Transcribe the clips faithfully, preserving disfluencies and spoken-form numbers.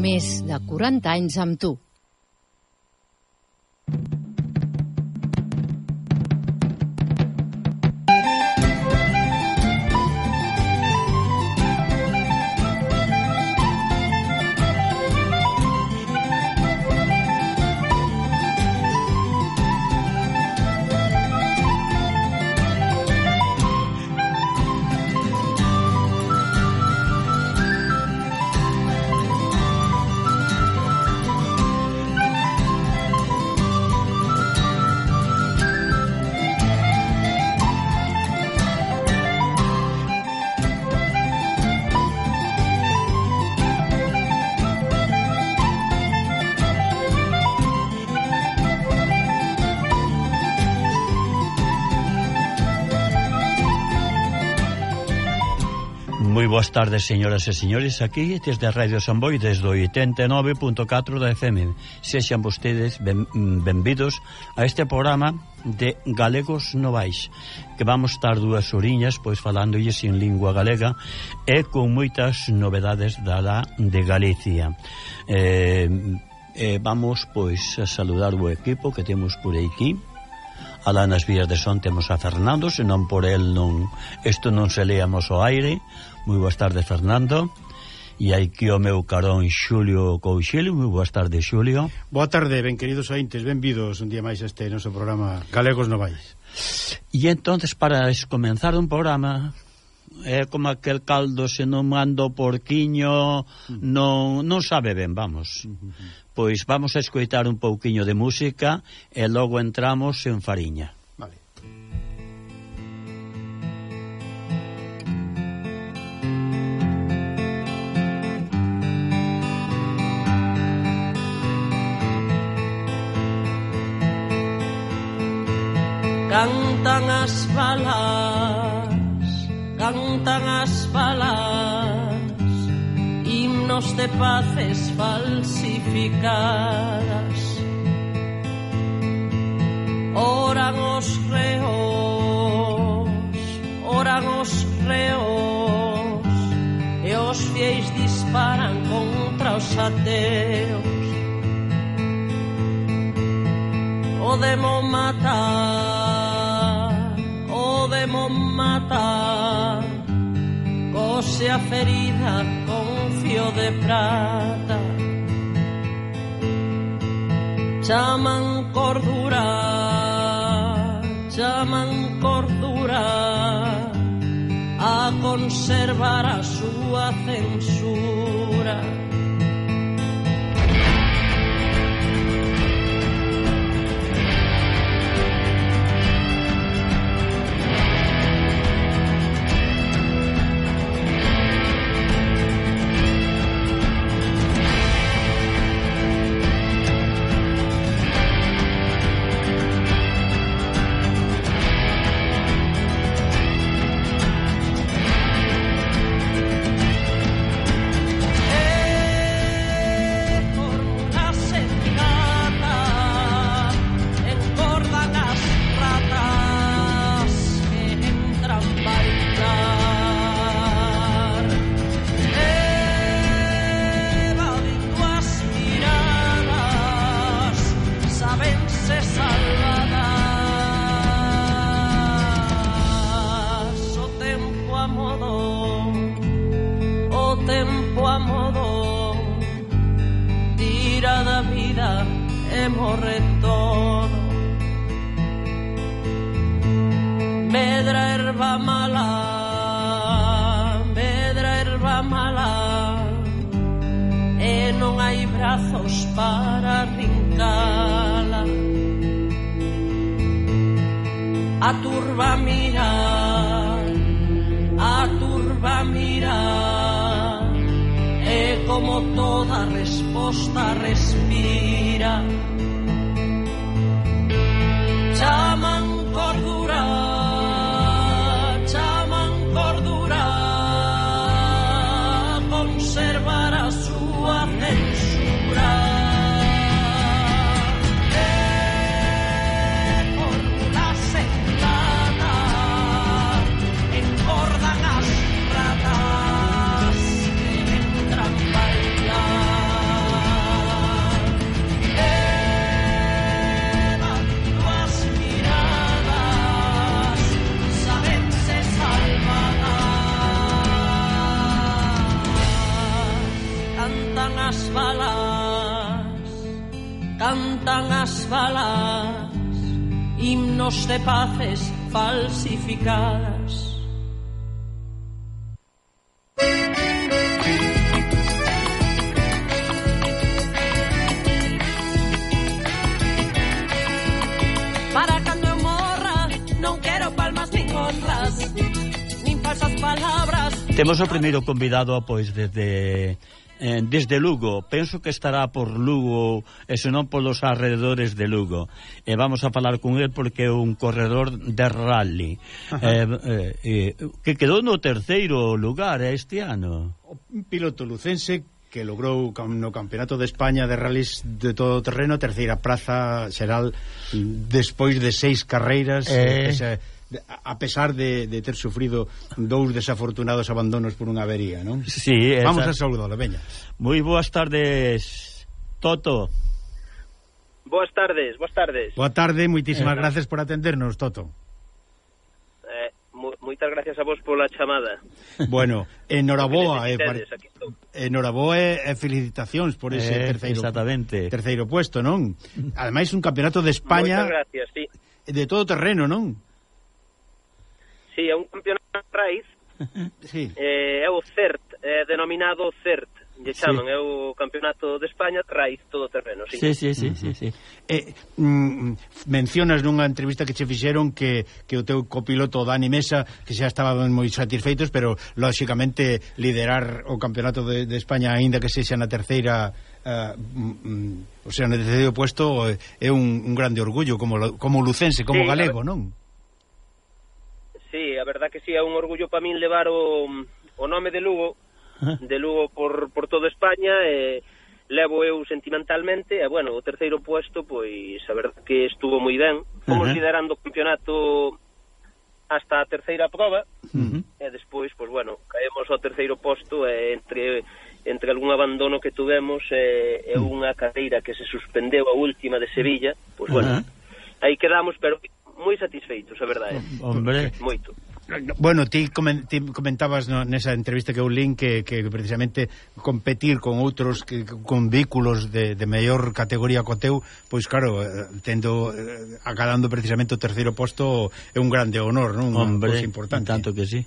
més de quaranta anys amb tu. Moi boas tardes, señoras e señores, aquí desde a Radio Samboy, desde o oitenta e nove punto catro da F M. Sexan vostedes ben, benvidos a este programa de Galegos Novais, que vamos estar dúas horiñas pois falándolles en lingua galega e con moitas novedades da la de Galicia. Eh, eh, vamos pois a saludar o equipo que temos por aquí. Alá nas vías de son temos a Fernando, senón por el non, isto non se leamos ao aire. Moi boas tardes, Fernando. E hai aquí o meu carón Xulio Couchil. Moi boas tardes, Xulio. Boa tarde, ben queridos ointes, benvidos un día máis a este noso programa Galegos Novais. E entonces, para comenzar un programa, é como aquel caldo se non mando porquiño, non, non sabe ben, vamos. Pois vamos a escoitar un pouquiño de música e logo entramos en fariña. Vale. Cantan as balas, cantan as balas, himnos de paces falsificadas. Oran os reos, oran os reos, e os fieis disparan contra os ateos. O demo matar, o demo matar, cose a ferida con fío de prata. Chaman cordura, chaman cordura, a conservar a súa censura. Para rincala, a turba mira, a turba mira, e como toda resposta respira. Chaman cordura, chaman cordura, conservar a súa censura. Encordan as ratas que entran bailar. Vivimos de paces falsificadas. Para cando eu morra, non quero palmas nin honras, nin falsas palabras. Temos o primeiro convidado, pois, desde eh, desde Lugo. Penso que estará por Lugo, e se non polos alrededores de Lugo. E vamos a falar con ele porque é un corredor de rally. Eh, eh, eh, que quedou no terceiro lugar este ano. Un piloto lucense que logrou no Campeonato de España de rallies de todo terreno terceira praza xeral despois de seis carreiras, eh... ese, a pesar de, de ter sufrido dous desafortunados abandonos por unha avería, non? Sí, esa... Vamos a saudalo, veña. Moi boas tardes, Toto. Boas tardes, boas tardes. Boa tarde, moitísimas eh, gracias por atendernos, Toto. Eh, moitas gracias a vos pola chamada. Bueno, enhoraboa, eh, pare... enhoraboa e eh, felicitacións por ese eh, terceiro exactamente. terceiro puesto, non? Ademais un campeonato de España. Moitas gracias, sí. De todo terreno, non? Sí, é un campeonato de raíz. Sí. Eh, é o CERT, é denominado CERT. Lle chaman, sí. É o campeonato de España de raíz todo terreno, sí. Sí, sí, sí, uh -huh. sí, sí. Eh, mm, mencionas nunha entrevista que che fixeron que, que o teu copiloto Dani Mesa, que xa estaban moi satisfeitos, pero lógicamente liderar o campeonato de, de España aínda que sexa na terceira uh, mm, o sea, no terceiro puesto é un, un grande orgullo como, como lucense, como sí, galego, non? Sí, a verdad que sí, é un orgullo para min levar o, o nome de Lugo, de Lugo por, por toda España, e levo eu sentimentalmente, e bueno, o terceiro puesto, pois a verdad que estuvo moi ben. Fomos uh -huh. liderando o campeonato hasta a terceira prova, uh -huh. e despois, pois bueno, caemos ao terceiro posto, e entre entre algún abandono que tuvemos e, e unha carreira que se suspendeu a última de Sevilla, pois bueno, uh -huh. aí quedamos, pero moi satisfeitos, a verdade. Hombre, moito. Bueno, ti, comen, ti comentabas no, nesa entrevista que eu lin que, que precisamente competir con outros que, con vehículos de, de maior categoría co teu, pois claro, tendo acadando precisamente o terceiro posto é un grande honor, non? Hombre, unha importante. Tanto que sí.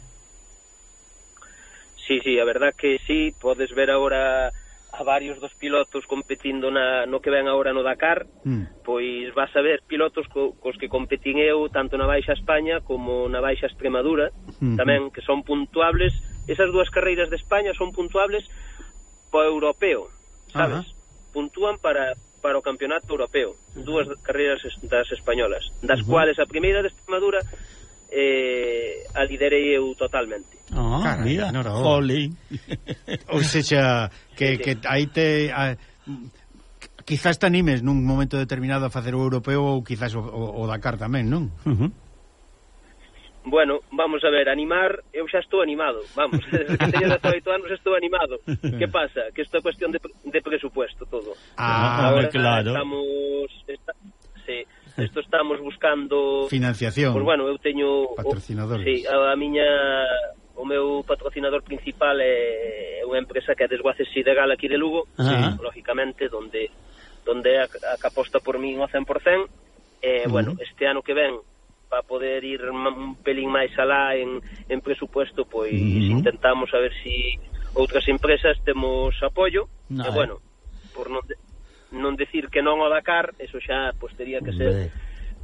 Sí, sí, a verdad que sí, podes ver agora a varios dos pilotos competindo na, no que ven agora no Dakar, mm. pois vas a ver pilotos co, cos que competín eu tanto na Baixa España como na Baixa Extremadura, mm. tamén, que son puntuables. Esas dúas carreiras de España son puntuables po europeo, sabes? Ajá. Puntúan para, para o campeonato europeo, dúas carreiras das españolas, das uh -huh. cuales a primeira de Extremadura eh, a liderei eu totalmente. Ah, caray, mira, no, no. Oli. Ou seja, que, sí, sí. que aí te a, quizás te animes nun momento determinado a facer o europeo ou quizás o, o, o Dakar tamén, non? Uh -huh. Bueno, vamos a ver, animar, eu xa estou animado, vamos, desde que teño dezoito anos estou animado. Que pasa? Que isto é cuestión de, de presupuesto todo. Ah, agora claro. Estamos, está, sí, isto estamos buscando financiación. Pois bueno, eu teño patrocinadores. O, sí, a, a miña o meu patrocinador principal é unha empresa que é Desguaces Sidegal aquí de Lugo, sí, lógicamente, donde donde a, a que aposta por min ao cen por cen. Eh, uh -huh. Bueno, este ano que ven, para poder ir un pelín máis alá en, en presupuesto, pois uh -huh. intentamos a ver si outras empresas temos apoio. No, e bueno, por non, de, non decir que non ao Dakar, eso xa pois tería que ser,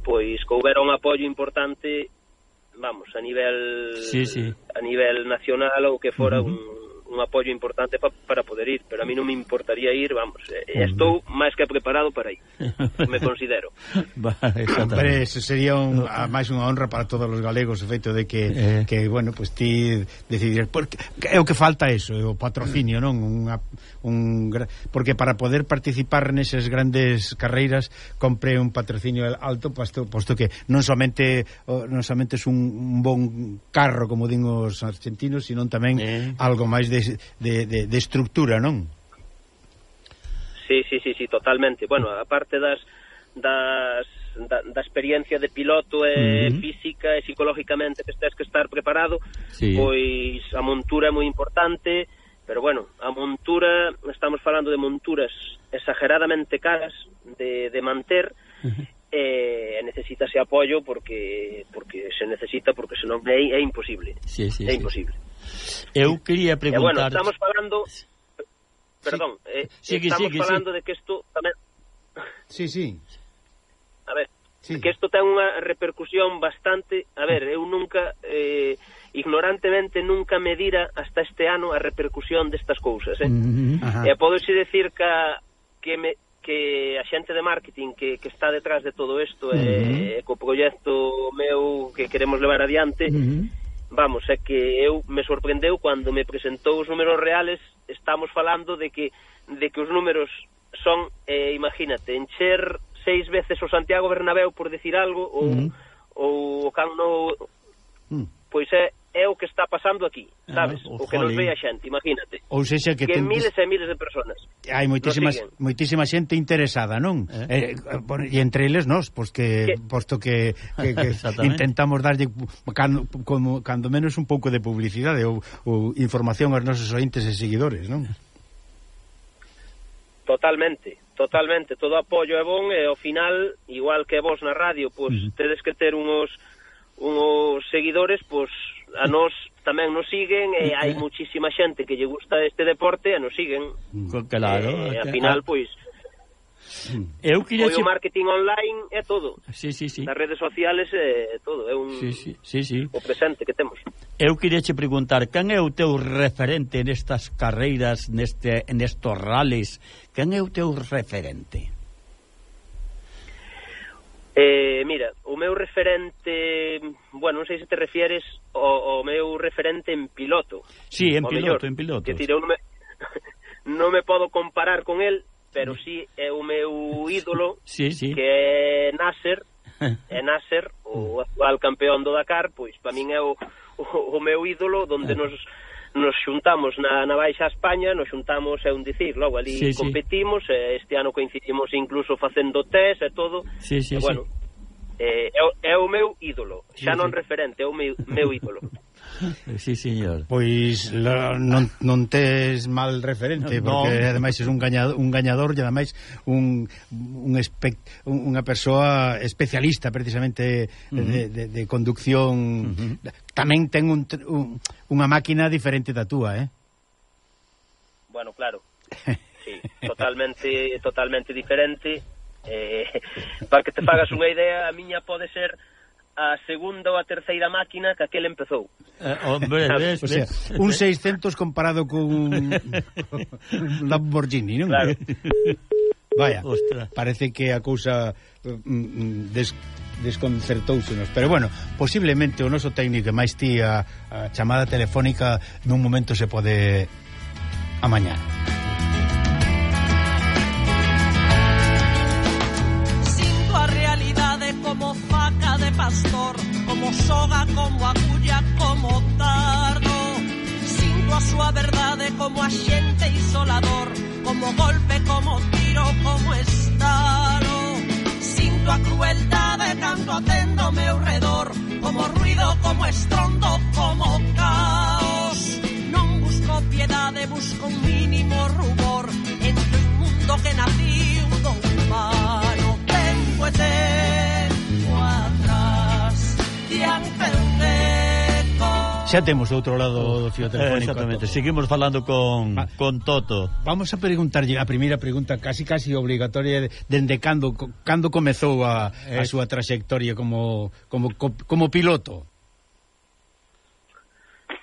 pois que houbera un apoio importante, vamos, a nivel sí, sí. a nivel nacional ou que fora uh -huh. un un apoio importante pa, para poder ir, pero a mí non me importaría ir, vamos, eh, estou máis que preparado para ir, me considero. Hombre, eso sería un, a, máis unha honra para todos os galegos, o feito de que, eh. que bueno, pues ti decidir, porque é o que falta eso, o patrocinio, non? Unha, un, porque para poder participar neses grandes carreiras compre un patrocinio alto, posto, posto que non somente non somente é un, un bon carro, como din os argentinos, sino tamén eh. algo máis de De, de, de estructura, non? Sí, sí, sí, sí, totalmente. Bueno, aparte das das da, da experiencia de piloto e uh-huh. física e psicológicamente que estés que estar preparado, sí. Pois a montura é moi importante, pero bueno, a montura, estamos falando de monturas exageradamente caras de, de manter, uh-huh. e eh, necesitase apoio porque porque se necesita, porque senón é, é imposible. Sí, sí, é sí. imposible. Eu quería preguntar... Eh, bueno, estamos falando... Perdón, sí. eh, sigue, estamos sigue, falando sí. de que isto tamén... Sí, sí. A ver, sí. que isto ten unha repercusión bastante... A ver, eu nunca... Eh, ignorantemente nunca me dira hasta este ano a repercusión destas cousas, eh? Uh-huh. E podo xe decir que, que, me, que a xente de marketing que, que está detrás de todo isto e uh-huh. co proxecto meu que queremos levar adiante, uh-huh. vamos, é que eu me sorprendeu cando me presentou os números reales. Estamos falando de que de que os números son, eh, imagínate, encher seis veces o Santiago Bernabéu, por decir algo, ou, uh-huh. ou o Camp Nou, uh-huh. pois é é o que está pasando aquí, sabes? Ah, o que nos ve a xente, imagínate. Ou sexa que, que ten... miles e miles de personas. Hai moitísimas moitísima xente interesada, non? Eh? Eh, e entre eles nós, pois que, que... posto que, que, que intentamos darlle cando, como, cando menos un pouco de publicidade ou, ou información aos nosos ointes e seguidores, non? Totalmente, totalmente. Todo apoio é bon e ao final, igual que vos na radio, pois uh-huh. tedes que ter unos unos seguidores, pois a nós tamén nos siguen e hai muchísima xente que lle gusta este deporte e nos siguen. Claro. E, ao final, pois, eu queria o marketing online é todo. Sí, sí, sí. Nas redes sociales é todo, é un sí, sí, sí, sí. o presente que temos. Eu queria che preguntar, quen é o teu referente nestas carreiras, neste nestos rallies? Quen é o teu referente? Eh, mira, o meu referente, bueno, non sei se te refieres ao, ao meu referente en piloto. Sí, en piloto, mellor. en piloto. Que decir, eu non me, non me podo comparar con el, pero sí é o meu ídolo, sí, sí. que é Nasser, é Nasser, o actual campeón do Dakar, pois para min é o, o, o meu ídolo, donde nos nos xuntamos na, na Baixa España, nos xuntamos, é un dicir, logo ali sí, competimos, sí. E este ano coincidimos incluso facendo test e todo, sí, sí, e bueno, sí. eh, é, é o meu ídolo, xa sí, non sí. referente, é o meu, meu ídolo. Sí, señor. Pois la, non, non tes mal referente, no, porque no. ademais é un gañador, un gañador e ademais un, un espect, un, unha persoa especialista precisamente uh -huh. de, de, de conducción. Uh -huh. Tamén ten un, un, unha máquina diferente da túa, eh? Bueno, claro. Sí, totalmente totalmente diferente. Eh, para que te fagas unha idea, a miña pode ser a segunda ou a terceira máquina que aquel empezou. Eh, hombre, ves, o sea, un seiscentos comparado con un, un Lamborghini, non? Claro. Vaya, ostras. Parece que a cousa mm, des, desconcertóusenos, pero bueno, posiblemente o noso técnico máis ti a, a chamada telefónica nun momento se pode amañar. Sinto a realidade como faca de pastor, como soga, como agulla, como tardo. Sinto a súa verdade como axente isolador, como golpe, como tiro, como estalo. Sinto a crueldade cando atendo meu redor, como ruido, como estrondo, como caos. Non busco piedade, busco un mínimo rubor entre un mundo que naciu do humano. Tempo e tempo atrás, diante un eco. Xa temos do outro lado do fío telefónico. Exactamente, seguimos falando con, Va, con Toto. Vamos a preguntarlle a primeira pregunta casi casi obligatoria, dende cando cando comezou a, a súa traxectoria como, como, como piloto?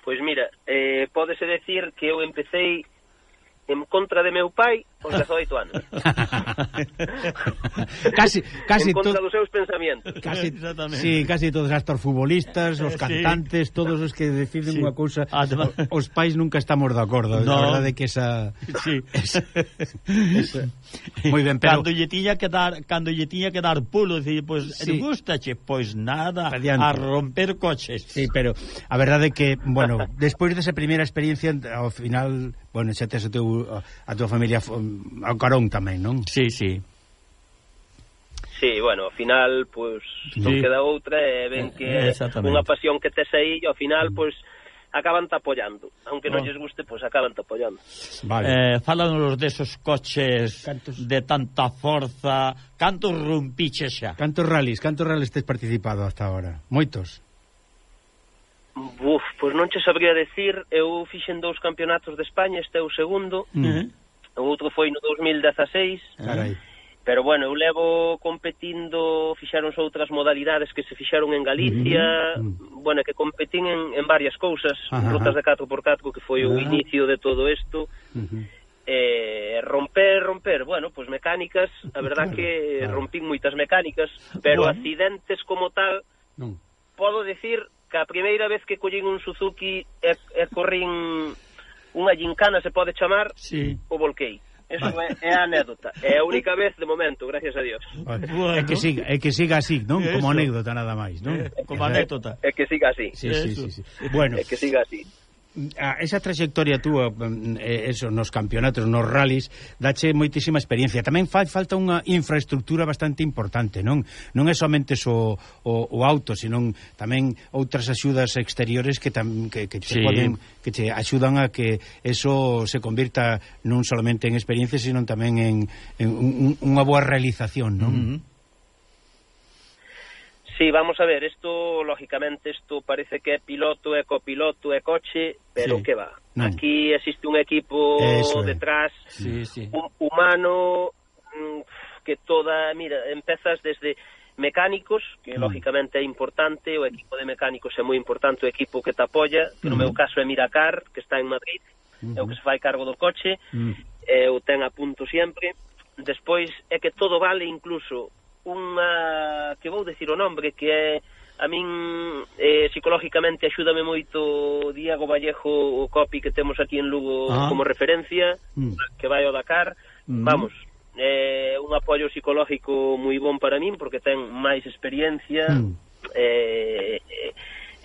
Pois mira, eh, pódese decir que eu empecei en contra de meu pai aos dezoito anos. casi casi en contra dos seus pensamentos. Casi, sí, casi todos hasta os futbolistas, os cantantes, sí. Todos os que deciden sí. unha cousa, Además... os pais nunca estamos de acordo. No. A verdade é que esa sí. esa, esa moi ben, pero cando lle tiña que dar, cando lle tiña que dar pulo, dicir, pois pues, sí. gustache, pois pues nada, Adiante. A romper coches. Sí, pero a verdade é que, bueno, despois desa primeira experiencia, ao final, bueno, xa tes o teu a tua familia ao carón tamén, non? Sí, sí. Sí, bueno, ao final, pois, sí. non queda outra, e ven que é unha pasión que tes aí, e ao final, pois, acaban te apoyando, aunque non oh. lles guste, pois pues, acaban te apoyando. Vale. Eh, fálanos desos coches cantos... de tanta forza, cantos rumpiches xa? Cantos rallies, cantos rallies tes participado hasta ahora? Moitos? Uf, pois non che sabría decir, eu fixen dous campeonatos de España, este é o segundo, mm. o outro foi no dos mil dezaseis, carai. Pero bueno, eu levo competindo, fixaronse outras modalidades que se fixaron en Galicia, mm. bueno, que competín en, en varias cousas, ajá, rutas de catro por catro, que foi o ajá. inicio de todo isto, uh-huh. eh, romper, romper, bueno, pois pues mecánicas, a verdad claro, que claro. rompín moitas mecánicas, pero bueno. accidentes como tal, non. Podo dicir que a primeira vez que collín un Suzuki e, e corrín unha gincana, se pode chamar, sí. o volquei. Eso vale. é, é a anécdota. É a única vez de momento, gracias a Dios. Vale. Bueno. É que siga, é que siga así, non? Como anécdota nada máis, non? É, como anécdota. É que siga así. Sí, sí, sí, sí. Bueno, é que siga así. A esa trayectoria túa, eso, nos campeonatos, nos rallies, dache moitísima experiencia. Tamén fai falta unha infraestructura bastante importante, non? Non é somente o, o, o auto, senón tamén outras axudas exteriores que tam, que, que, sí. te poden, que te axudan a que eso se convirta non solamente en experiencia, senón tamén en, en un, unha boa realización, non? Uh-huh. Sí, vamos a ver, isto, lógicamente, isto parece que é piloto, é copiloto, é coche, pero sí. que va. Non. Aquí existe un equipo eso detrás, sí, sí. Un, humano, que toda, mira, empezas desde mecánicos, que mm. lógicamente é importante, o equipo de mecánicos é moi importante, o equipo que te apoia, que no mm. meu caso é Miracar, que está en Madrid, mm-hmm. é o que se fai cargo do coche, mm. eh, o ten a punto sempre. Despois é que todo vale, incluso unha, que vou decir o nombre, que é a min eh, psicológicamente axúdame moito Diego Vallejo, o copi que temos aquí en Lugo ah. como referencia, mm. que vai ao Dakar, mm. vamos, é eh, un apoio psicológico moi bon para min, porque ten máis experiencia, mm. e eh, eh,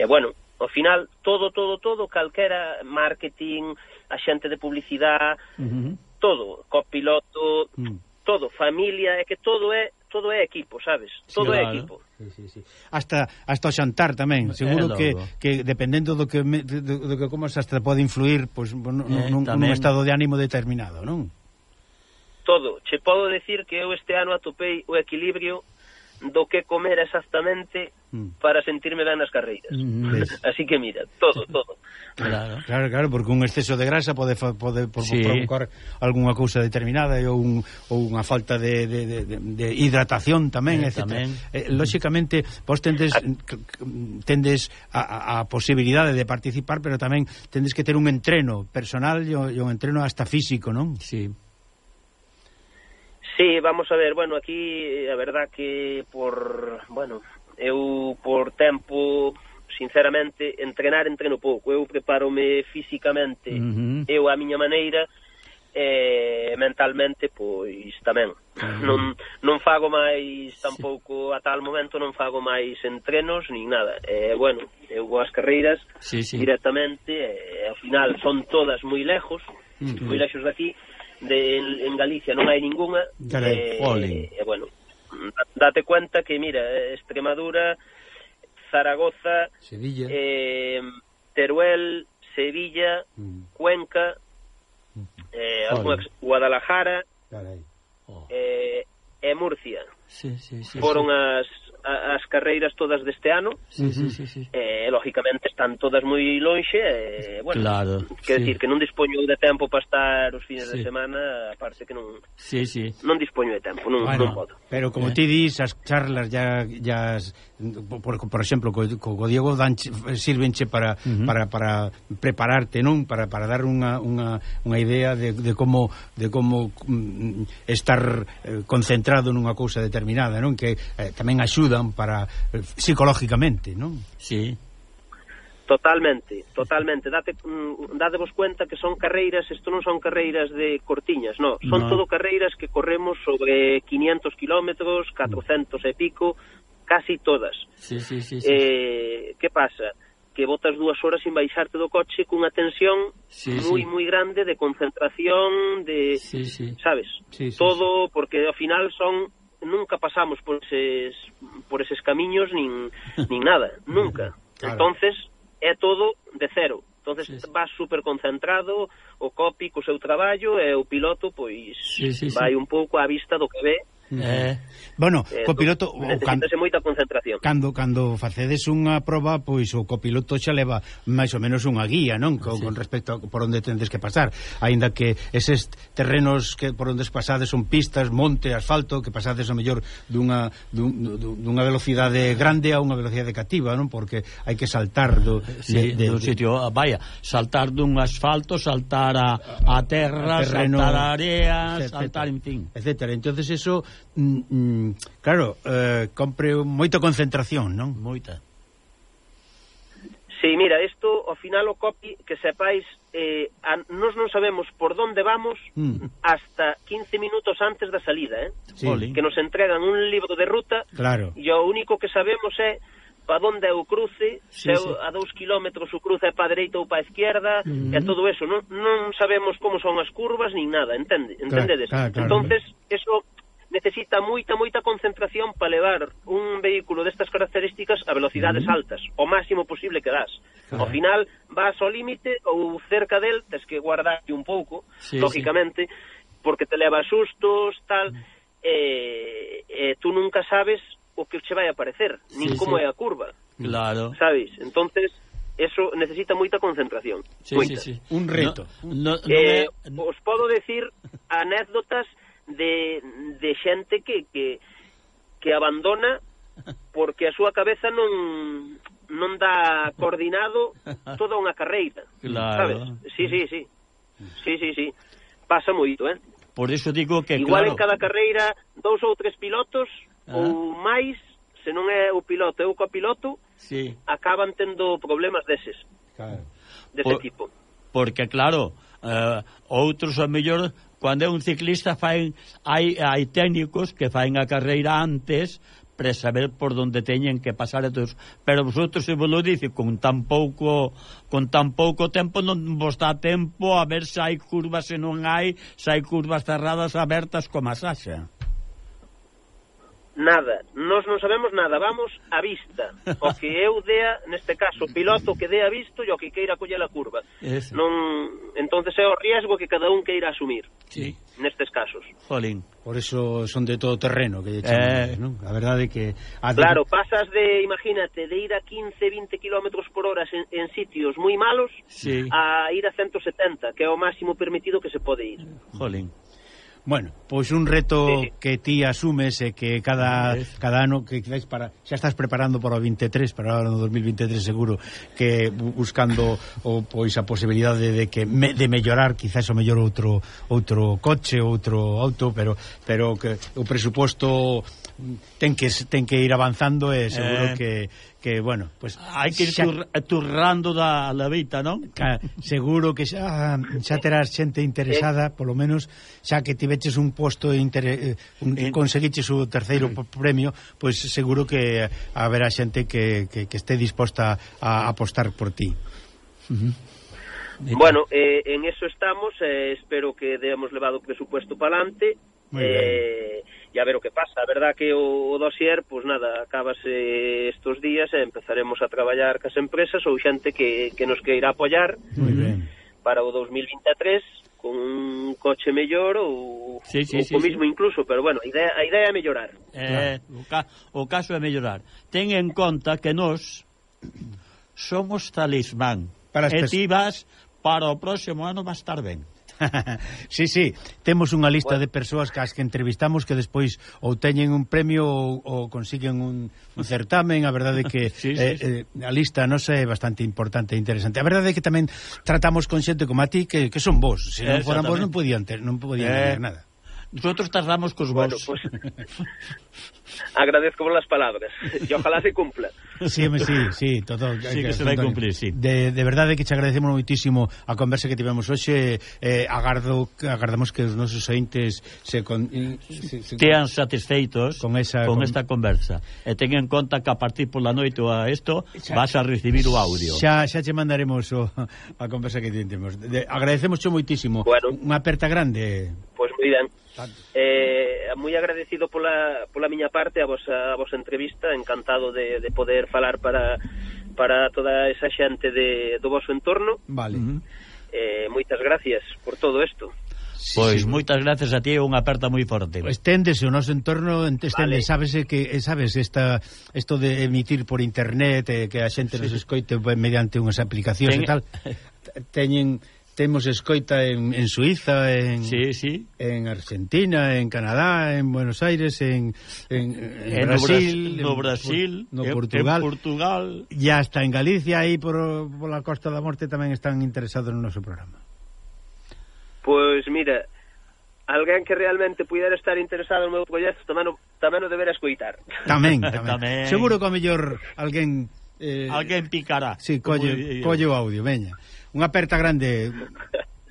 eh, bueno, ao final, todo, todo, todo, calquera marketing, axente de publicidade, mm-hmm. todo, copiloto, mm. todo, familia, é que todo é todo é equipo, sabes? Todo sí, é claro. equipo. Sí, sí, sí. Hasta hasta o xantar tamén, seguro que, que dependendo do que me, do, do que comas hasta pode influir, pois pues, nun, eh, nun, nun estado de ánimo determinado, non? Todo. Che podo decir que eu este ano atopei o equilibrio do que comer exactamente mm. para sentirme ben nas carreiras. Mm, así que mira, todo, todo. Claro, claro, claro, porque un exceso de grasa pode, pode por, sí. provocar algunha cousa determinada ou, un, ou unha falta de, de, de, de hidratación tamén, eh, etcétera. Tamén. Eh, lóxicamente, vos tendes tendes a, a posibilidade de participar, pero tamén tendes que ter un entreno personal e un entreno hasta físico, non? Sí. Sí, vamos a ver, bueno, aquí a verdad que por, bueno, eu por tempo, sinceramente, entrenar entreno pouco, eu preparome físicamente, uh-huh. eu a miña maneira, e mentalmente, pois, tamén. Uh-huh. Non, non fago máis, tampouco, a tal momento non fago máis entrenos, nin nada. E, bueno, eu vou ás carreiras sí, sí. directamente, e ao final son todas moi lejos, uh-huh. moi lejos daqui, de en Galicia non hai ninguna, e eh, eh, bueno, date cuenta que mira, Extremadura, Zaragoza, Sevilla, eh, Teruel, Sevilla, mm. Cuenca, eh, Guadalajara, oh. eh, e Murcia. Sí, sí, sí, foron sí. as as carreiras todas deste ano, sí, sí, sí, sí. Eh, lógicamente están todas moi lonxe, e, eh, bueno, claro, quer sí. decir que non dispoño de tempo para estar os fines sí. de semana, aparte que non sí, sí. non dispoño de tempo, non, bueno, non podo. Pero como eh. ti dis, as charlas ya, ya por, por exemplo, co, co Diego dan, sirvenche para, uh-huh. para, para prepararte, non? Para, para dar unha, unha, unha idea de, de como, de como mm, estar eh, concentrado nunha cousa determinada, non? Que eh, tamén axuda para eh, psicológicamente, non? Sí. Totalmente, totalmente. Date, mm, dadevos cuenta que son carreiras, isto non son carreiras de cortiñas, no, son no. todo carreiras que corremos sobre quinientos kilómetros, catrocentos e pico, casi todas. Sí, sí, sí, sí. Eh, que pasa? Que botas dúas horas sin baixarte do coche cunha tensión sí, moi, sí. moi grande de concentración, de, sí, sí. sabes? Sí, sí, todo, sí. porque ao final son nunca pasamos por eses por eses camiños nin nin nada, nunca. Claro. Entonces é todo de cero, Entonces sí, sí. vas super concentrado, o copy co seu traballo, e o piloto, pois, sí, sí, vai sí. un pouco á vista do que ve. Eh, bueno, eh, copiloto necesitase moita concentración. Cando cando facedes unha proba, pois o copiloto xa leva máis ou menos unha guía, non? Con, sí. con respecto a por onde tendes que pasar, aínda que eses terrenos que por onde pasades son pistas, monte, asfalto, que pasades o mellor dunha dun, dunha velocidade grande a unha velocidade cativa, non? Porque hai que saltar do sí, de, de, do sitio, vaya, saltar dun asfalto, saltar a, a terra, a terreno, saltar a area, etcétera, saltar, en fin, etcétera. Entonces eso Mm, mm, claro, eh, compre moita concentración, non? Moita. Sí, mira, isto ao final o copy, que sepáis, eh, a, nos non sabemos por donde vamos mm. hasta quince minutos antes da salida, eh? Sí. Que nos entregan un libro de ruta, claro. E o único que sabemos é para onde é o cruce, sí, se sí. a dous kilómetros o cruce é para a dereita ou para a esquerda, mm. e todo eso, non, non sabemos como son as curvas nin nada, entende? Entendedes? Claro, claro, claro. Entonces, eso necesita moita, moita concentración para levar un vehículo destas características a velocidades mm. altas, o máximo posible que das. Claro. Ao final, vas ao límite ou cerca del, tes que guardarte un pouco, sí, lógicamente, sí. porque te leva sustos, tal, mm. eh, eh, tú nunca sabes o que che vai a aparecer, nin sí, como sí. é a curva. Claro. Sabes? Entonces, eso necesita moita concentración. Sí, moita. sí, sí. Un reto. No, no, eh, no, os podo decir anécdotas de, de xente que, que que abandona porque a súa cabeza non non dá coordinado toda unha carreira, claro. Sabes? Sí, sí, sí. Sí, sí, sí. Pasa moito, eh? Por eso digo que igual claro. en cada carreira dous ou tres pilotos ah. ou máis, se non é o piloto e o copiloto, sí. acaban tendo problemas deses. Claro. Dese Por, tipo. Porque claro, uh, outros a mellor cando é un ciclista faen, hai, hai técnicos que faen a carreira antes para saber por donde teñen que pasar a todos. Pero vosotros, se vos lo dice, con tan pouco con tan pouco tempo non vos dá tempo a ver se hai curvas, se non hai, se hai curvas cerradas, abertas, como a Saxa. Nada, nós non sabemos nada, vamos a vista. O que eu dea, neste caso, o piloto que dea visto e o que queira coller a curva. Eso. Non, entonces é o riesgo que cada un queira asumir. Sí. Nestes casos. Jolín. Por eso son de todo terreno, que chaman, eh... ¿no? A verdade é que a claro, pasas de, imagínate, de ir a quince, veinte kilómetros por hora en, en sitios moi malos, sí. a ir a ciento setenta, que é o máximo permitido que se pode ir. Jolín. Bueno, pois un reto sí, sí. que ti asumes e que cada cada ano que quizás para xa estás preparando para o veintitrés, para o ano dos mil veintitrés seguro, que buscando o pois a posibilidade de que me, de mellorar quizás o mellor outro outro coche, outro auto, pero pero que o presuposto ten que ten que ir avanzando e seguro eh... que que, bueno, pues hai que ir xa... turrando da levita, non? Ca, seguro que xa, xa terás xente interesada, polo menos xa que tiveches un posto inter... un, en... conseguiches o terceiro mm. premio, pois pues seguro que haberá xente que, que, que esté disposta a apostar por ti. Uh-huh. Bueno, eh, en eso estamos, eh, espero que demos levado o presupuesto para adelante. Eh, e a ver o que pasa. A verdad que o, o dossier, pois pues nada, acabase estos días e empezaremos a traballar cas empresas ou xente que, que nos queira apoiar para o dos mil veintitrés con un coche mellor ou, sí, sí, ou sí, co mismo sí. incluso, pero bueno, a idea, a idea é mellorar. Eh, claro. o, ca, o caso é mellorar. Ten en conta que nós somos talismán para e ti vas para o próximo ano vas estar ben. Sí, sí, temos unha lista bueno. de persoas que as que entrevistamos que despois ou teñen un premio ou, ou consiguen un, un certamen. A verdade é que sí, sí, eh, sí. Eh, a lista non é bastante importante e interesante. A verdade é que tamén tratamos con xente como a ti que, que son vos. Se non foran vos non podían ter, non podían eh, ter nada. Nosotros tardamos cos vos. Bueno, pues, agradezco por las palabras e ojalá se cumpla. Sí, sí, sí, todo, sí que, que se vai cumplir, sí. De, de verdade que te agradecemos moitísimo a conversa que tivemos hoxe. Eh, agardo, agardamos que os nosos ointes se, con, se, se tean satisfeitos con, esa, con, con esta conversa. E ten en conta que a partir pola noite a isto xa, vas a recibir o audio. Xa, xa che mandaremos o, a conversa que temos. De, agradecemos moitísimo. Bueno, unha aperta grande. Pois pues moi ben. Eh, moi agradecido pola, pola miña parte a vosa, a vosa entrevista, encantado de, de poder falar para para toda esa xente de, do vosso entorno. Vale. Uh-huh. Eh, moitas gracias por todo isto. Sí, pois sí, moitas gracias a ti, unha aperta moi forte. Esténdese o noso entorno, estende, vale. Sabes que sabes esta isto de emitir por internet, eh, que a xente sí. nos escoite mediante unhas aplicacións Ten... e tal. Teñen temos escoita en, en Suiza, en sí, sí. en Argentina, en Canadá, en Buenos Aires, en, en, en, en Brasil, no Brasil, en, no Portugal, en Portugal, e hasta en Galicia, aí por, por la Costa da Morte tamén están interesados no noso programa. Pois mira, alguén que realmente puidera estar interesado no meu proxecto tamén o, tamén o debera escoitar. Tamén, tamén. tamén. Seguro que ao mellor alguén eh, alguén picará. Sí, colle, colle o audio, veña. Unha aperta grande.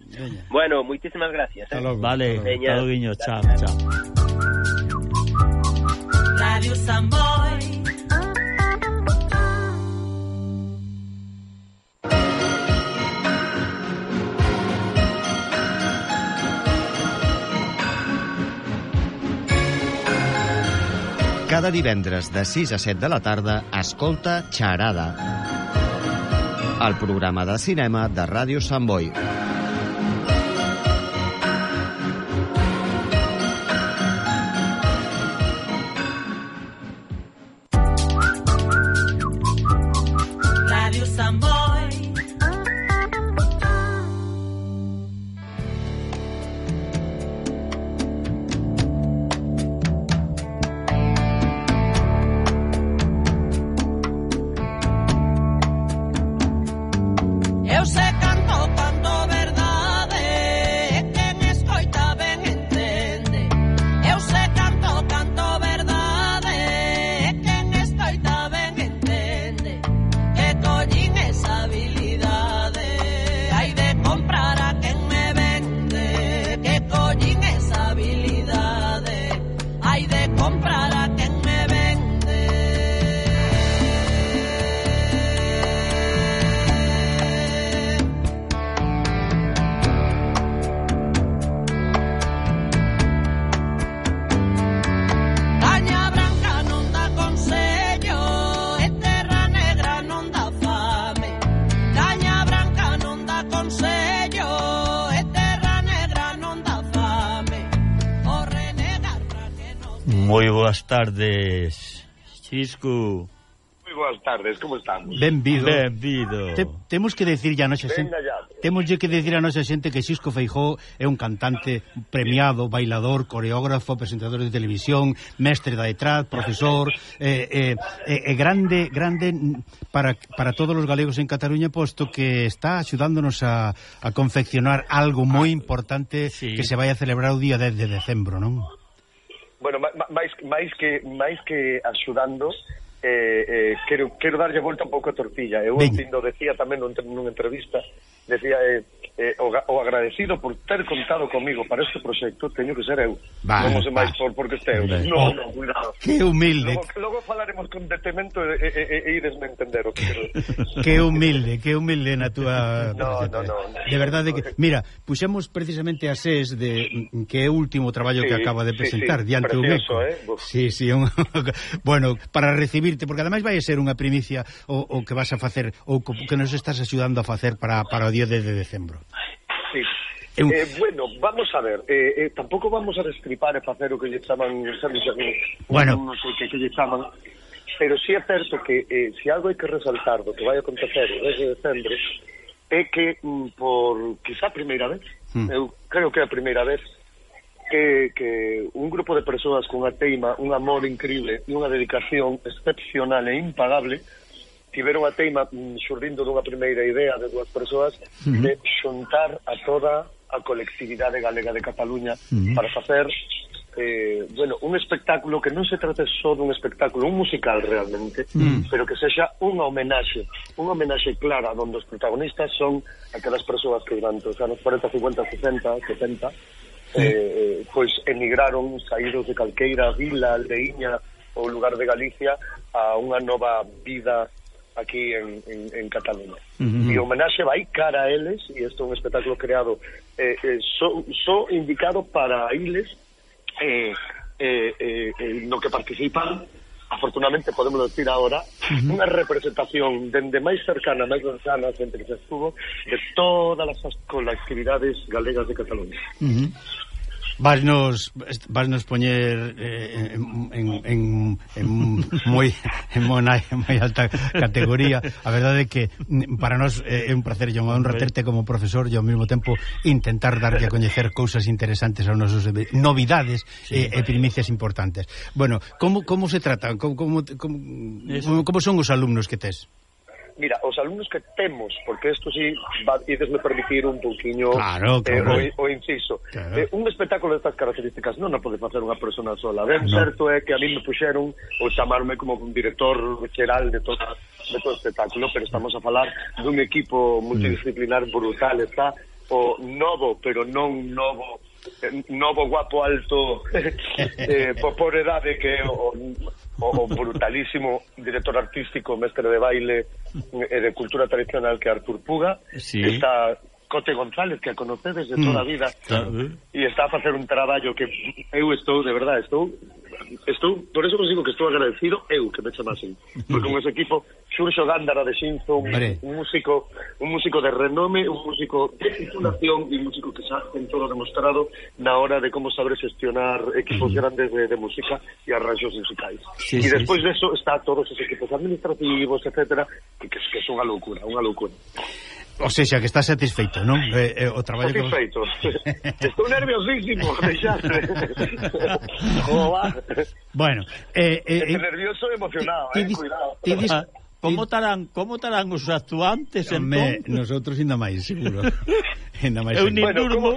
Veña. Bueno, moitísimas gracias. Eh. Logo, vale, hasta logo, guiño, chao, chao. Radio Samboy. Cada divendres de sis a set de la tarda escolta Xarada, el programa de cinema de Ràdio Sant Boi. Ràdio Sant Boi. Moi boas tardes, Xisco. Moi boas tardes, como estamos? Benvido. Benvido. Te, temos que decir a nosa xente, temos que decir a nosa xente que Xisco Feijóo é un cantante premiado, bailador, coreógrafo, presentador de televisión, mestre da detrás, profesor, eh, eh, eh, grande, grande para, para todos os galegos en Cataluña, posto que está axudándonos a, a confeccionar algo moi importante sí. que se vai a celebrar o día dez de decembro, non? Bueno, máis, máis que máis que axudando, eh, eh, quero, quero darlle volta un pouco a tortilla. Eu entindo, decía tamén nunha entrevista, decía eh, eh, o, o agradecido por ter contado comigo para este proxecto teño que ser eu. Vale, non sei máis por porque este eu. No, no, cuidado. Que humilde. Logo, logo falaremos con detemento e, e, e, e idesme entender o que quero. Que humilde, que humilde na túa... No, no, no, no. De verdade que... Mira, puxemos precisamente a SES de que é o último traballo sí, que acaba de presentar sí, sí, diante un eco. Eh? Sí, sí, un... bueno, para recibirte, porque ademais vai a ser unha primicia o, o que vas a facer, ou que nos estás axudando a facer para, para o día de decembro. Sí. Eu... Eh, bueno, vamos a ver, eh, eh, tampouco vamos a destripar e facer o que lle chaman, sabes, bueno, non sei que, que lle chaman, pero si sí é certo que eh, se si algo hai que resaltar do que vai acontecer o dez de decembro é que mm, por quizá a primeira vez, mm. eu creo que é a primeira vez que, que un grupo de persoas con unha teima, un amor increíble e unha dedicación excepcional e impagable tiveron a teima mm, xurdindo dunha primeira idea de dúas persoas uh-huh. de xuntar a toda a colectividade galega de Cataluña uh-huh. para facer eh, bueno, un espectáculo que non se trate só dun espectáculo, un musical realmente, uh-huh. pero que sexa unha homenaxe, unha homenaxe clara onde os protagonistas son aquelas persoas que durante os anos cuarenta, cincuenta, sesenta, setenta uh-huh. eh, pois emigraron saídos de calqueira vila, aldeiña ou lugar de Galicia a unha nova vida aquí en, en, en Cataluña. Uh-huh. E o homenaxe vai cara a eles, e isto é un espectáculo creado eh, eh, só so indicado para eles eh, eh, eh, no que participan afortunadamente podemos decir ahora, uh-huh. unha representación dende máis cercana, máis cercana, xente que se estuvo, de todas as colectividades galegas de Cataluña. Uh-huh. Vasnos, vasnos poñer eh, en, en, en, en moi en moi alta categoría. A verdade é que para nós é un placer e unha honra terte como profesor e ao mesmo tempo intentar darlle a coñecer cousas interesantes aos nosos novidades sí, e, e primicias importantes. Bueno, como, como se trata? Como, como, como, como son os alumnos que tes? Mira, os alumnos que temos, porque isto sí, va, idesme permitir un pouquiño claro, claro. eh, o, o inciso. Claro. Eh, un espectáculo destas características non o pode facer unha persona sola. Ben, no. Certo é que a mí me puxeron o chamarme como un director xeral de todo, de todo o espectáculo, pero estamos a falar dun equipo multidisciplinar brutal. Está o novo, pero non novo, novo guapo alto eh, por, por edade que o, o, o brutalísimo director artístico, mestre de baile e de cultura tradicional que é Artur Puga. Sí. Está Cote González, que a conocedes de toda a vida, claro. E está a facer un traballo que eu estou, de verdade, estou estou, por eso vos digo que estou agradecido eu que me chamasen, porque con ese equipo Xurxo Gándara de Xinzo, un, un músico un músico de renome, un músico de titulación e un músico que xa ten todo demostrado na hora de como saber gestionar equipos uh-huh. grandes de, de música e arranxos musicais. Sí, e sí, despois sí. de eso está todos os equipos administrativos, etcétera, que, que, que son unha loucura, unha loucura. O sea, que estás satisfeito, non? Eh, eh, o traballo satisfeito. Que... Estou nerviosísimo, deixaste. Joder. Bueno, eh, eh, Estou nervioso e emocionado, eh, cuidado. Ti dis... Como estarán, como estarán os actuantes, entón? Nosotros ainda máis, seguro. Ainda máis. Eu ni durmo.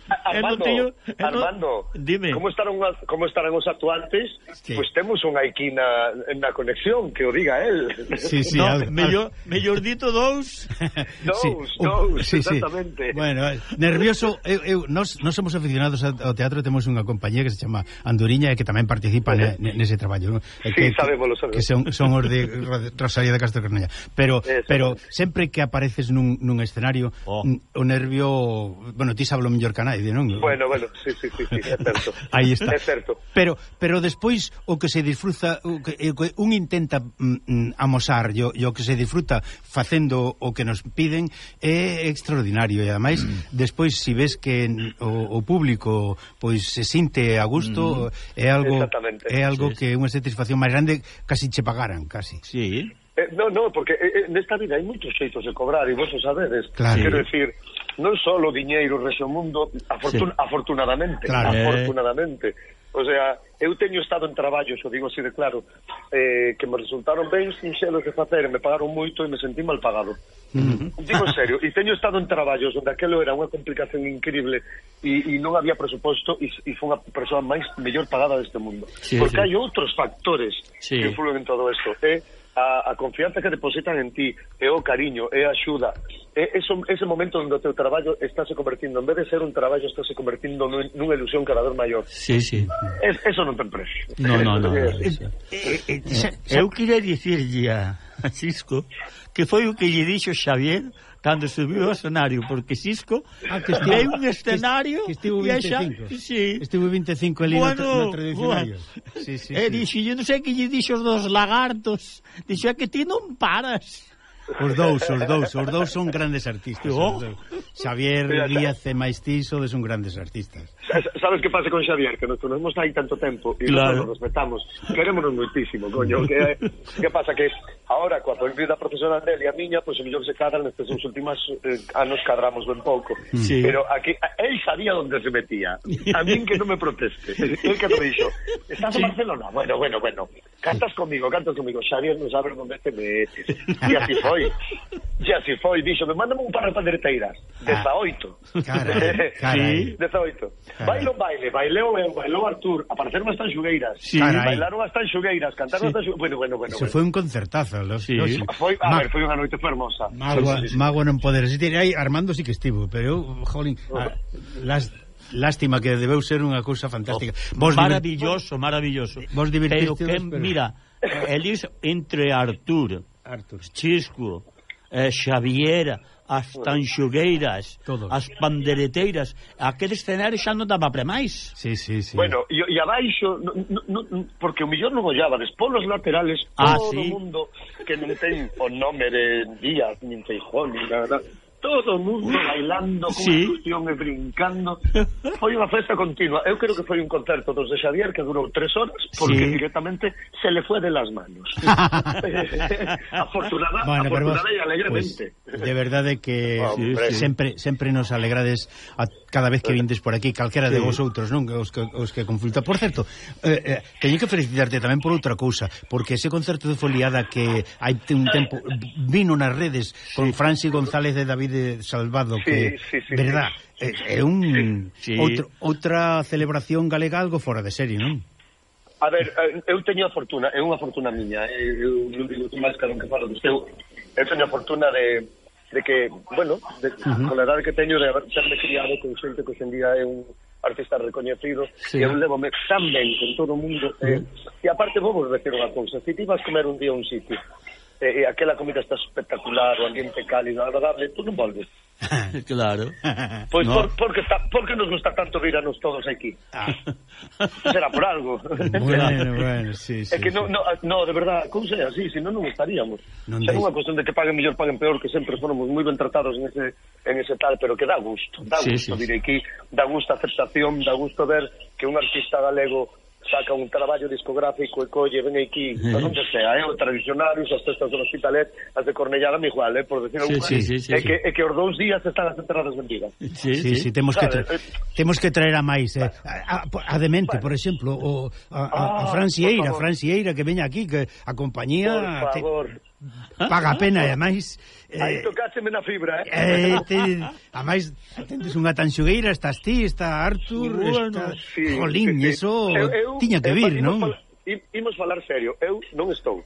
Armando, teño, Armando, dime. Como estarán como estarán os actuantes? Pois pues temos unha aquí na, na conexión que o diga el. Sí, sí, no, al, mellor, mellor dito dous. Dous, sí, dous, sí, exactamente. Sí. Bueno, nervioso, eu, eu nos, nos somos aficionados ao teatro, temos unha compañía que se chama Anduriña e que tamén participa uh-huh. ne, nese traballo, ¿no? Sí, que, sabemos, lo sabemos. Que son, son os de Rosalía de Castro Carnella. Pero pero sempre que apareces nun, nun escenario, oh. o nervio, bueno, ti sabes lo mellor que a nadie, non? Bueno, bueno, sí, sí, sí, sí, é certo. Aí está. É certo. Pero pero despois o que se disfruta, o que, o que un intenta mm, amosar, e o que se disfruta facendo o que nos piden é extraordinario e ademais mm. despois si ves que o, o público pois se sinte a gusto, mm. é algo é algo sí, que é unha satisfacción máis grande, casi che pagaran, casi. Sí. Eh, no, no, porque eh, nesta vida hai moitos xeitos de cobrar e vos o sabedes. Claro. Quero decir, non só o diñeiro rexe o mundo, afortun sí. afortunadamente, claro. afortunadamente. O sea, eu teño estado en traballos, o digo así de claro, eh, que me resultaron ben sinxelos de facer, e me pagaron moito e me sentí mal pagado. Uh-huh. Digo en serio, e teño estado en traballos onde aquelo era unha complicación increíble e, e non había presuposto e, e foi unha persoa máis mellor pagada deste mundo. Sí, porque sí. hai outros factores sí. que influen en todo isto. Eh? A, a confianza que depositan en ti, é o cariño, é a axuda, é eso, ese momento onde o teu traballo estáse convertindo, en vez de ser un traballo, estáse convertindo nun, nunha ilusión cada vez maior. Sí, sí. Es, eso non ten precio. No, no, no. no. Eh, eh, eh, eu queria dicirlle a Cisco que foi o que lle dixo Xavier cando subiu ao escenario, porque Cisco ah, que estivo, é un escenario que estivo veinticinco, sí. estivo veinticinco ali bueno, no, no tradicionario. Bueno. Sí, sí, e sí. dixo, eu non sei que lle dixo dos lagartos, dixo que ti non paras. Os dous, os dous, os dous son grandes artistas. Oh. Xavier Díaz e máis ti sodes son grandes artistas. Sabes que pasa con Xavier? Que nos conocemos hai tanto tempo e claro. nos respetamos. Querémonos moitísimo, coño. Que, que pasa? Que ahora, coa vida profesional dele e a miña, pois pues, o mellor se cadran nestes últimos eh, anos cadramos ben pouco. Sí. Pero aquí, él sabía onde se metía. A min que non me proteste. El que me dixo, estás en sí. Barcelona? Bueno, bueno, bueno. Cantas comigo, cantas comigo. Xavier non sabe onde te metes. E así foi. E así foi, dixo, me mándame un par de pandereteiras. dezaoito. Carai, carai. dezaoito. Bailo baile, baileo eu, bailou Artur, apareceron as tanxugueiras. Sí. Bailaron as tanxugueiras, cantaron sí. as tanxugueiras. Bueno, bueno, bueno. Se bueno. foi un concertazo, lo, sí. lo, foi, a Ma ver, foi unha noite fermosa. Magua, sí, sí, sí. Magua non poder resistir. Aí Armando sí que estivo, pero eu, jolín, uh -huh. las lástima que debeu ser unha cousa fantástica. Oh, maravilloso, maravilloso. Vos divertistedes, pero que, pero... mira, elis entre Artur, Artur, Chisco, eh, Xaviera, as tanxugueiras, todos. As pandereteiras, aquele escenario xa non daba para máis. Sí, sí, sí. Bueno, e, e abaixo, no, no, no, porque o millón non ollaba, despois los laterales, ah, todo o sí? mundo que non ten o nome de Díaz, nin Feijón, nin nada, todo o mundo bailando, con sí. ilusión e brincando. Foi unha festa continua. Eu creo que foi un concerto dos de Xavier que durou tres horas, porque sí. directamente se le fue de las manos. Afortunada, bueno, afortunada e alegremente. Pues, de verdade que sí, sí. sempre sempre nos alegrades a cada vez que vindes por aquí, calquera sí. de vosotros, non? Os que, os que consulta. Por certo, eh, eh, teño que felicitarte tamén por outra cousa, porque ese concerto de Foliada que hai un tempo vino nas redes con sí. Franci González de David Salvado, que, sí, sí, sí, verdad, é, é un sí. outro, outra celebración galega algo fora de serie, non? A ver, eu teño a fortuna, é unha fortuna miña, eu non digo tú máis que non que falo do seu, eu teño a fortuna de, de que, bueno, de, uh-huh. con a edade que teño de haberme criado con xente que hoxendía é un artista recoñecido, sí. e eu levo-me tan ben con todo o mundo, uh-huh. eh, e aparte vou vos decir unha cousa, se ti vas comer un día a un sitio, e eh, aquela comida está espectacular, o ambiente cálido, agradable, tú non volves. Claro. Pois pues no. por, porque, está, porque nos gusta tanto virarnos todos aquí. Ah. Será por algo. Bueno, bueno, sí, sí. É que sí. no, no, no, de verdad, como sea así, se non non estaríamos. Non é unha cuestión de que paguen mellor, paguen peor, que sempre fomos moi ben tratados en ese, en ese tal, pero que dá gusto, dá sí, gusto sí, vir aquí, dá gusto a aceptación, dá gusto ver que un artista galego saca un traballo discográfico e colle, ven aquí, sí. a onde sea, eh, o tradicionarios, as festas do Hospitalet, as de Cornellá dan igual, eh, por decir algo, sí, sí, sí, é, sí, que, sí. é que os dous días están as entradas vendidas. Sí, sí, sí, sí, temos que tra temos que traer a máis, eh, a, a, a Demente, por exemplo, o a, a, a Francieira, Francieira que veña aquí, que a compañía por favor. Te... paga a pena, e ademais eh, aí tocácheme na fibra, eh, eh te, ademais tendes unha tanxugueira, estás ti, está Artur, bueno, está sí, Jolín, sí, sí. Eso eu, eu, tiña que vir, non? Fal imos falar serio, eu non estou.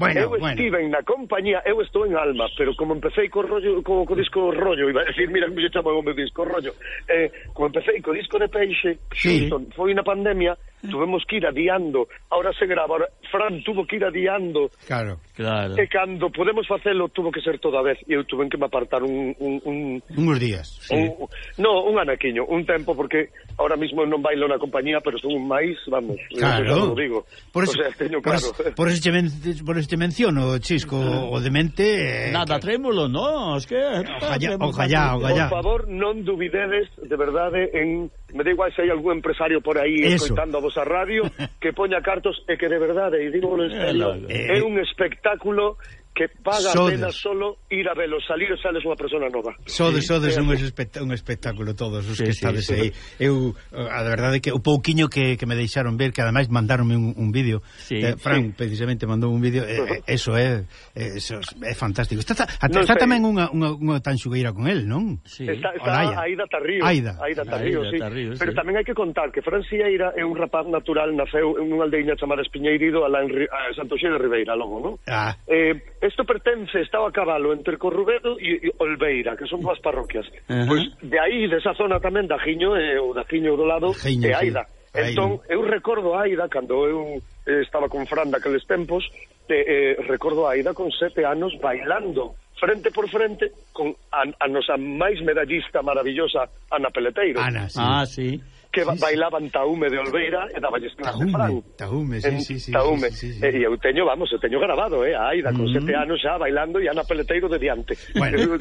Bueno, eu bueno. estive na compañía, eu estou en Alma, pero como empecé co rollo, co, co disco rollo, iba a decir, mira, me chamo o meu disco rollo, eh, como empecé co disco de Peixe, sí. foi na pandemia, tuvemos que ir adiando, ahora se grava, ahora Fran tuvo que ir adiando, claro, claro. E cando podemos facelo tuvo que ser toda vez, e eu tuve que me apartar un... un, un Unhos días, sí. un, no, un anaquiño, un tempo, porque ahora mismo non bailo na compañía, pero son un máis, vamos, claro. Eu digo, por eso, o sea, teño claro. Por, por, eso te men, por eso te menciono, Chisco, o Demente... Eh, Nada, que... trémulo, no, es que... Ojalá, ojalá, ojalá. Por favor, non dubidedes, de verdade, en... Me da igual se hai algún empresario por aí escoitando a vosa radio que poña cartos e que de verdade, e digo en serio, eh, é un espectáculo que paga a pena solo ir a velo, salir e sales unha persona nova. Sodes, sí, sodes un, espect un espectáculo todos os sí, que estades sí, aí. Sí. Eu, a verdade é que o pouquiño que, que me deixaron ver, que ademais mandaronme un, un vídeo, sí, eh, Fran sí. precisamente mandou un vídeo, eh, uh -huh. eso é eh, eso é fantástico. Está, está, no está tamén unha, unha, unha tanxugueira con el, non? Sí. Está, está Aida Tarrío. Aida, Aida Tarrío, sí. Tarrío, pero sí. tamén hai que contar que Fran Sieira é un rapaz natural, naceu en unha aldeiña chamada Espiñeirido, alá en a Santoxé de Ribeira, logo, non? Ah. Eh, isto pertence, estaba a cabalo entre Corrubedo e, e Olveira, que son dúas parroquias. Uh -huh. Pois de aí, desa zona tamén, da Jiño, e o da Jiño do lado, Jiño, e Aida. Sí. Entón, eu recordo a Aida, cando eu eh, estaba con Fran daqueles tempos, te, eh, recordo a Aida con sete anos bailando frente por frente con a, a nosa máis medallista maravillosa Ana Peleteiro. Ana, sí. Ah, sí. Que sí, bailaban Taume de Olveira e daballes clase Fran. Taume, sí, sí, sí. Taume. Sí, sí, sí. E eu teño, vamos, eu teño grabado, eh, a Aida con mm. sete anos xa bailando e Ana Peleteiro de diante. Bueno.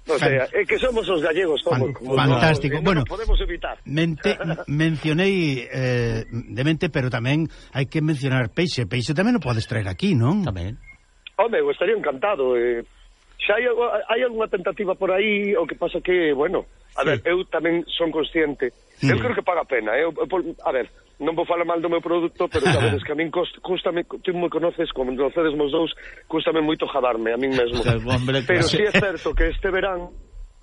O sea, é que somos os gallegos, somos. Fan, fantástico. No, bueno, no podemos evitar. Mente, mencionei eh, Demente, pero tamén hai que mencionar Peixe. Peixe tamén o podes traer aquí, non? Tamén. Home, eu estaría encantado, eh. Xa hai, hai algunha tentativa por aí, o que pasa que, bueno, a sí. ver, eu tamén son consciente. Eu creo que paga a pena. Eu, eu, a ver, non vou falar mal do meu produto, pero sabedes que a min custame, tú me conoces, como nos conocedes mos dous, custame moito jadarme a min mesmo. Pero si sí é certo que este verán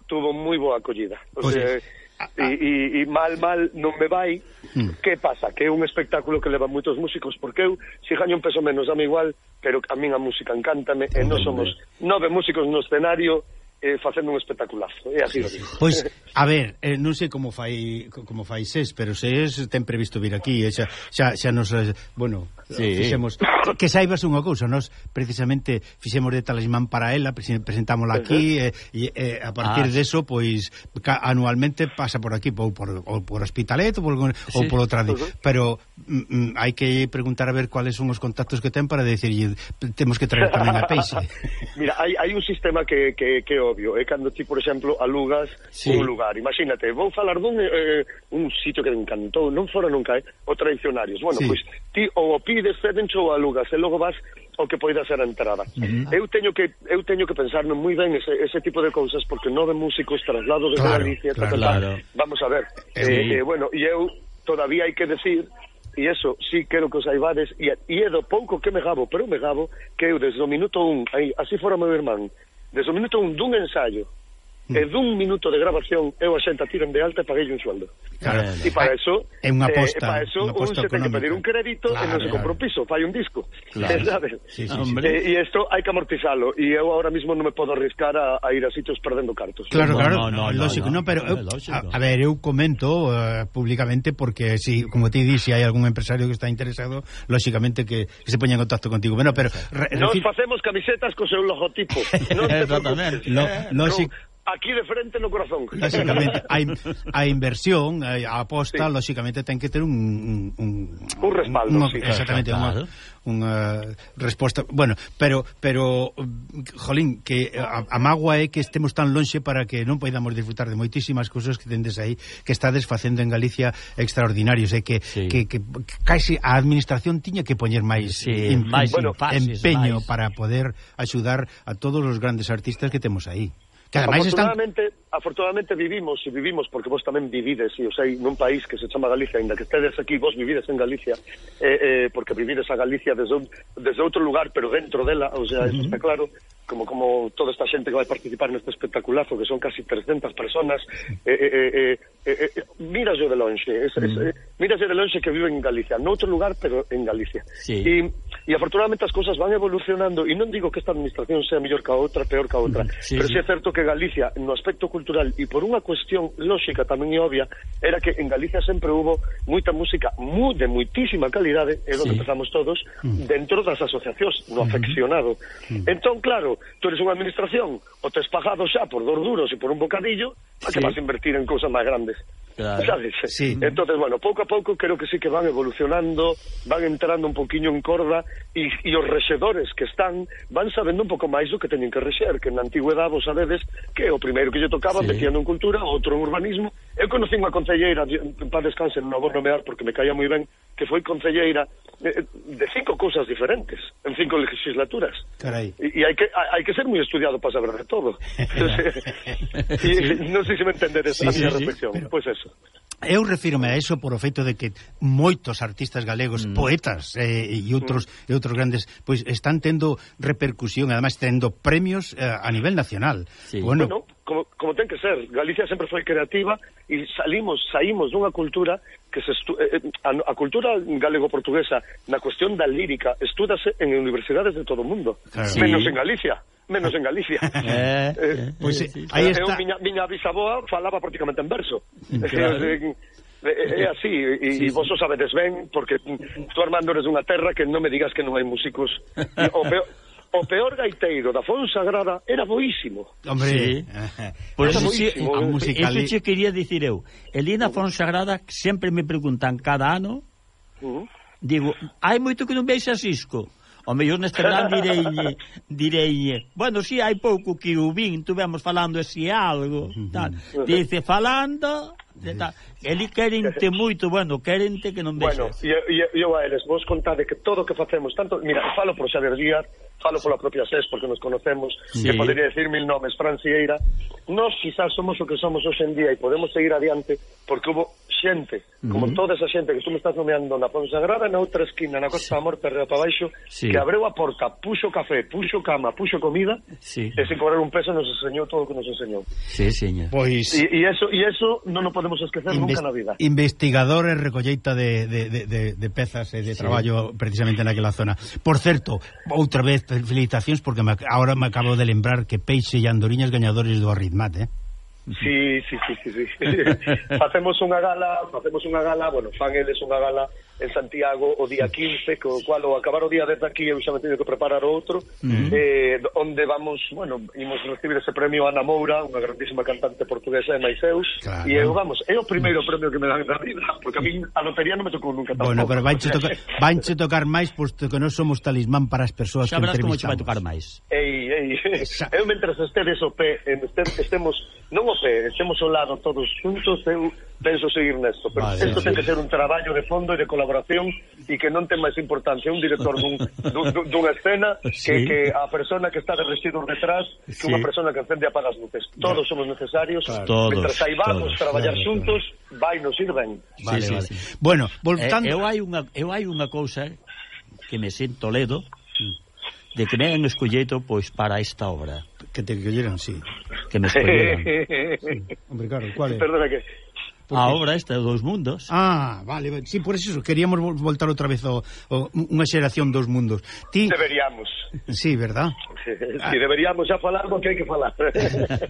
tuvo moi boa acollida. O pues sea, e, e, e mal, mal non me vai. Hmm. Que pasa? Que é un espectáculo que leva moitos músicos, porque eu, se gaño un peso menos, dame igual, pero a min a música encántame, e non somos nove músicos no escenario, eh, facendo un espectaculazo, e así lo digo. Pois, a ver, eh, non sei como fai como fai SES, pero SES ten previsto vir aquí, e xa, xa, xa nos, eh, bueno, sí. fixemos, que saibas unha cousa, nos precisamente fixemos de talismán para ela, presentámola aquí, e uh -huh. eh, eh, a partir ah, de eso, pois, anualmente pasa por aquí, ou por, ou por Hospitalet, ou por, sí. ou por outra, uh -huh. pero mm, hai que preguntar a ver cuáles son os contactos que ten para decirlle, temos que traer tamén a peixe. Mira, hai, hai un sistema que, que, que obvio, é cando ti, por exemplo, alugas sí. un lugar. Imagínate, vou falar dun eh, un sitio que me encantou, non fora nunca, eh, o Tradicionarios. Bueno, sí. pois ti ou o pides, cedencho ou alugas, e logo vas o que poida ser a entrada. Uh -huh. Eu teño que eu teño que pensar moi ben ese, ese tipo de cousas, porque nove músicos traslado desde claro, Galicia, claro, tal, claro. Vamos a ver. Eh, eh, bueno, e eu todavía hai que decir, e eso sí quero que os saibades, e, e é do pouco que me gabo, pero me gabo que eu desde o minuto un, aí, así fora meu irmán, desde o minuto un dun ensayo mm. e dun minuto de grabación eu a xenta tiran de alta e paguei un sueldo. Claro, e para eso é unha aposta, eh, para eso un se ten que pedir un crédito claro, e non se compra un piso, fai un disco. Claro. ¿Sabes? Sí, sí, sí. E eh, isto hai que amortizalo e eu ahora mismo non me podo arriscar a, a ir a sitios perdendo cartos. Claro, claro, no, no, no, lógico, no, no, pero eu, a, a ver, eu comento uh, públicamente porque si, como te di, se si hai algún empresario que está interesado, lógicamente que, que se poña en contacto contigo. Bueno, pero re, nos facemos camisetas co seu logotipo. Non te preocupes. Lo, lógico. Aquí de frente no corazón. Lógicamente, a inversión, a aposta, sí. lógicamente ten que ter un un, un, un respaldo, un, sí. Exactamente, unha unha resposta, bueno, pero pero jolín, que a, a mágoa é que estemos tan lonxe para que non podamos disfrutar de moitísimas cousas que tendes aí, que estades facendo en Galicia extraordinarios, e que, sí. que, que casi a administración tiña que poñer máis, sí, em, máis bueno, empeño máis. Para poder axudar a todos os grandes artistas que temos aí. Que afortunadamente, están... afortunadamente vivimos e vivimos porque vos tamén vivides, e o sei, nun país que se chama Galicia, ainda que estedes aquí, vos vivides en Galicia, eh, eh, porque vivides a Galicia desde, un, desde outro lugar, pero dentro dela, o sea, uh -huh. eso está claro, como como toda esta xente que vai participar neste espectaculazo, que son casi trescentas personas, eh, eh, eh, eh, eh, mírase de lonxe, es, uh -huh. es, eh, mírase de lonxe que viven en Galicia, noutro lugar, pero en Galicia. Sí. E, e afortunadamente as cousas van evolucionando, e non digo que esta administración sea mellor que a outra, peor que a outra, sí, pero sí é certo que Galicia, no aspecto cultural, e por unha cuestión lógica tamén e obvia, era que en Galicia sempre hubo moita música moi, de moitísima calidade, é onde sí. empezamos todos, dentro das asociacións, no afeccionado. Uh -huh. Entón, claro, tú eres unha administración, o tes pagado xa por dos duros e por un bocadillo, a que sí. vas a invertir en cousas máis grandes. Claro. ¿Sabes? Sí. Entonces, bueno, pouco a pouco creo que sí que van evolucionando, van entrando un poquinho en corda, e, e os rexedores que están van sabendo un pouco máis do que teñen que rexer, que na antigüedade vos sabedes que o primeiro que lle tocaba sí. metían en cultura, outro en urbanismo. Eu conocí unha concelleira, para descanse, non a vou nomear porque me caía moi ben, que foi concelleira de cinco cousas diferentes, en cinco legislaturas. Carai. E, e hai que hai que ser moi estudiado para saber de todo. E, non sei se me entenderes sí, a miña sí, reflexión. Sí, pero... Pois pues eso. Eu refírome a eso por o feito de que moitos artistas galegos, mm. poetas eh, e outros mm. e outros grandes, pois están tendo repercusión, además tendo premios eh, a nivel nacional. Sí. Bueno, bueno como, como ten que ser, Galicia sempre foi creativa e salimos, saímos dunha cultura que se estu eh, a, a cultura galego-portuguesa na cuestión da lírica estúdase en universidades de todo o mundo, claro. sí. menos en Galicia. Menos en Galicia. Eh, eh, pois pues, sí, aí está. Eu, miña, miña bisaboa falaba prácticamente en verso. Claro. É así, e sí, vos o sabedes ben, porque tú, Armando, eres unha terra que non me digas que non hai músicos. O peor, o peor gaiteiro da Fonsagrada era boísimo. Hombre, sí. Por eso, sí, eso che quería dicir eu. El ir na Fonsagrada sempre me preguntan cada ano, uh -huh. digo, hai moito que non veis a Cisco. O mellor neste plan direi, direi, bueno, si sí, hai pouco que o vin, tuvemos falando así algo, tal. Dice, falando, tal. Eli querente moito, bueno, querente que non vexas. Bueno, e eu a eles, vos contade que todo o que facemos, tanto, mira, falo por Xavier Díaz, falo pola propia SES, porque nos conocemos, sí. que podería decir mil nomes, Fran Sieira, nós quizás somos o que somos hoxe en día e podemos seguir adiante, porque hubo xente, como uh-huh. toda esa xente que tú me estás nomeando na Fonsagrada, na outra esquina, na Costa sí. da Morte, arriba para baixo, sí. que abreu a porta, puxo café, puxo cama, puxo comida, sí. e sin cobrar un peso nos enseñou todo o que nos enseñou. Sí, señor. Pois... E, e eso, e eso non o podemos esquecer Inves... nunca na vida. Investigador e recolleita de, de, de, de, de pezas e de sí. traballo precisamente naquela zona. Por certo, outra vez, felicitacións, porque me, ahora me acabo de lembrar que Peixe e Andoriñas gañadores do Arritmat, eh? Sí, sí, sí, sí, sí. Facemos unha gala, facemos unha gala, bueno, fan eles unha gala en Santiago o día quince, co cual ao acabar o día desde aquí eu xa me teño que preparar outro, uh-huh. eh, onde vamos, bueno, imos recibir ese premio a Ana Moura, unha grandísima cantante portuguesa de Maiseus, claro. E eu, vamos, é o primeiro premio que me dan na vida, porque a mí a lotería non me tocou nunca tampouco. Bueno, pero vanche tocar, vanche tocar máis, posto que non somos talismán para as persoas que entrevistamos. Xa verás como che vai tocar máis. Ei, ei, eu mentres estedes o pé, estemos, non o pé, estemos ao lado todos xuntos, eu penso seguir nesto, pero vale, isto sí. ten que ser un traballo de fondo e de colaboración e que non ten máis importancia un director dun, dun, dunha escena sí. que, que a persona que está de residuos detrás que sí. unha persona que encende e apaga as luces. Todos somos necesarios, claro. todos, mentre saibamos todos, traballar claro, xuntos, claro. vai nos ir ben. Vale, sí, vale. Sí, sí. Bueno, voltando... Eh, eu hai unha eu hai unha cousa que me sinto ledo de que me han escolleito pois para esta obra. Que te escolleran, sí. Que me escolleran. Sí. Hombre, claro, ¿cuál é? Perdona que... A obra esta dos mundos. Ah, vale, vale. Sí, por eso queríamos voltar outra vez ao, ao unha xeración dos mundos. Ti... Deberíamos. Sí, verdad? Sí, sí, deberíamos xa falar do que hai que falar.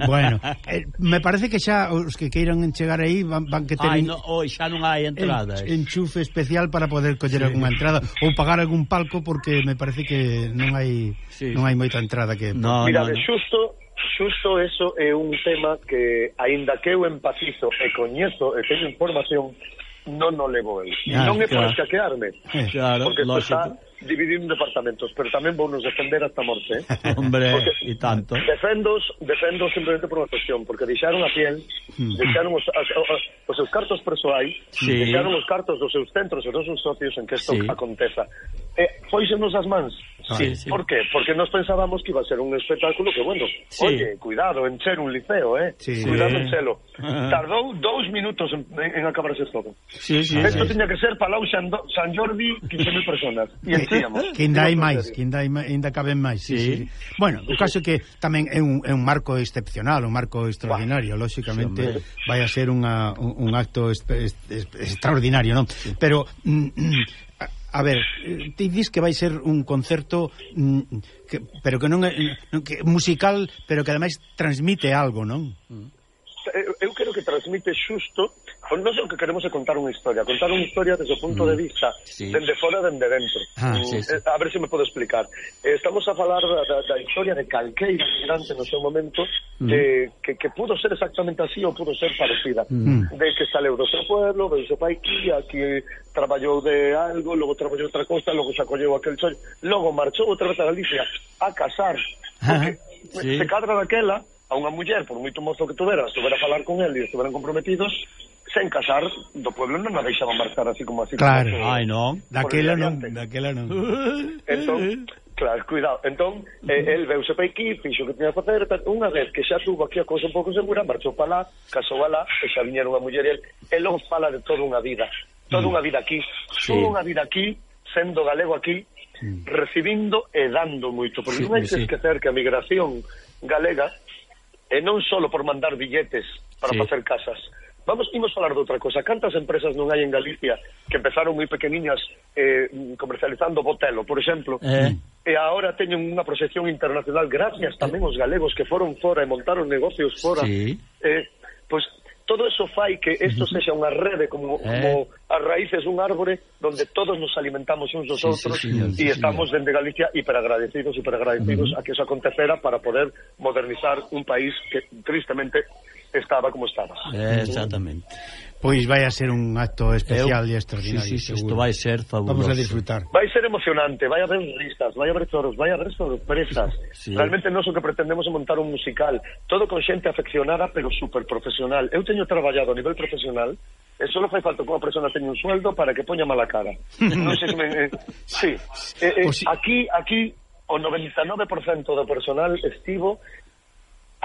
Bueno, eh, me parece que xa os que queiran chegar aí van, van que ter... Ai, no, oi, xa non hai entradas. En, enchufe especial para poder coller sí. algunha entrada ou pagar algún palco, porque me parece que non hai sí. non hai moita entrada que... No, Mira, no, no. xusto... Xusto eso é un tema que, aínda que eu empatizo e coñezo e teño información, non o levo eu. Ah, non é claro. por escaquearme, claro, porque isto está dividindo departamentos, pero tamén vou nos defender hasta a morte, eh? Hombre, e tanto. Defendos, defendos simplemente por unha cuestión, porque deixaron a piel, mm. deixaron os, as, os seus cartos persoais, sí. deixaron os cartos dos seus centros e dos seus socios en que isto sí. aconteza. Eh, Fóixenos as mans. Sí, sí. ¿Por qué? Porque nos pensábamos que iba a ser un espectáculo que, bueno, sí. oye, cuidado, encher un liceo, eh? Sí. Cuidado, enchelo. Tardou dous minutos en, en acabarse todo. Sí, sí. Esto sí. tiña que ser Palau San, San Jordi, quince mil personas. E enchíamos. Que ainda hai máis, que ainda, ainda caben máis. Sí, sí. sí. Bueno, o caso é que tamén é un, é un marco excepcional, un marco extraordinario. Bah. Lóxicamente, sí, vai a ser unha, un, un acto est, est, est, extraordinario, non? Sí. Pero... Mm, mm, a ver, ti dis que vai ser un concerto mm, que, pero que non é que, musical, pero que ademais transmite algo, non? Eu quero que transmite xusto, non sei o que queremos é contar unha historia, contar unha historia desde o punto mm. de vista sí. dende fora, dende dentro. Ah, sí, sí. A ver se me podo explicar. Estamos a falar da, da, da historia de calqueira migrante no seu momento mm. de, que, que pudo ser exactamente así ou pudo ser parecida. Mm. De que saleu do seu pueblo, do seu pai aquí, aquí traballou de algo, logo traballou outra cosa, logo se acolleu aquel chollo, logo marchou outra vez a Galicia a casar, porque ah, sí. se cadra daquela a unha muller, por moito mozo que tuvera, estuvera a falar con él e estuveran comprometidos, sen casar, do pueblo non a deixaban marchar así como así. Claro, como, ai non, daquela non, daquela non. Entón, claro, cuidado, entón, eh, el veuse pa aquí, fixo que tiña que facer, unha vez que xa tuvo aquí a cousa un pouco segura, marchou pa lá, casou a lá, e xa viñeron a muller e el, e logo fala de toda unha vida, toda unha vida aquí, sí. toda unha vida aquí, sendo galego aquí, sí. recibindo e dando moito, porque sí, non hai que sí. esquecer que a migración galega e non só por mandar billetes para sí. facer casas. Vamos, imos falar de outra cosa. Cantas empresas non hai en Galicia que empezaron moi pequeniñas eh, comercializando botelo, por exemplo, eh. e agora teñen unha proxección internacional gracias tamén aos galegos que foron fora e montaron negocios fora. Sí. Eh, pois todo eso fai que isto sexa unha rede como, eh. como as raíces dun árbore donde todos nos alimentamos uns dos sí, outros sí, señor, sí, e estamos señor. dende Galicia hiperagradecidos, hiperagradecidos uh-huh. a que eso acontecera para poder modernizar un país que tristemente estaba como estaba. Eh, exactamente. Pois vai a ser un acto especial e extraordinario. Sí, sí, isto vai ser fabuloso. Vamos a disfrutar. Vai ser emocionante, vai haber ristas, vai haber toros, vai haber sorpresas. Sí. Realmente nós o que pretendemos é montar un musical, todo con xente afeccionada, pero super profesional. Eu teño traballado a nivel profesional, e só fai falta que unha persona teña un sueldo para que poña mala cara. Non sei se me... Eh, sí. Eh, eh, aquí, aquí, o noventa e nove por cento do personal estivo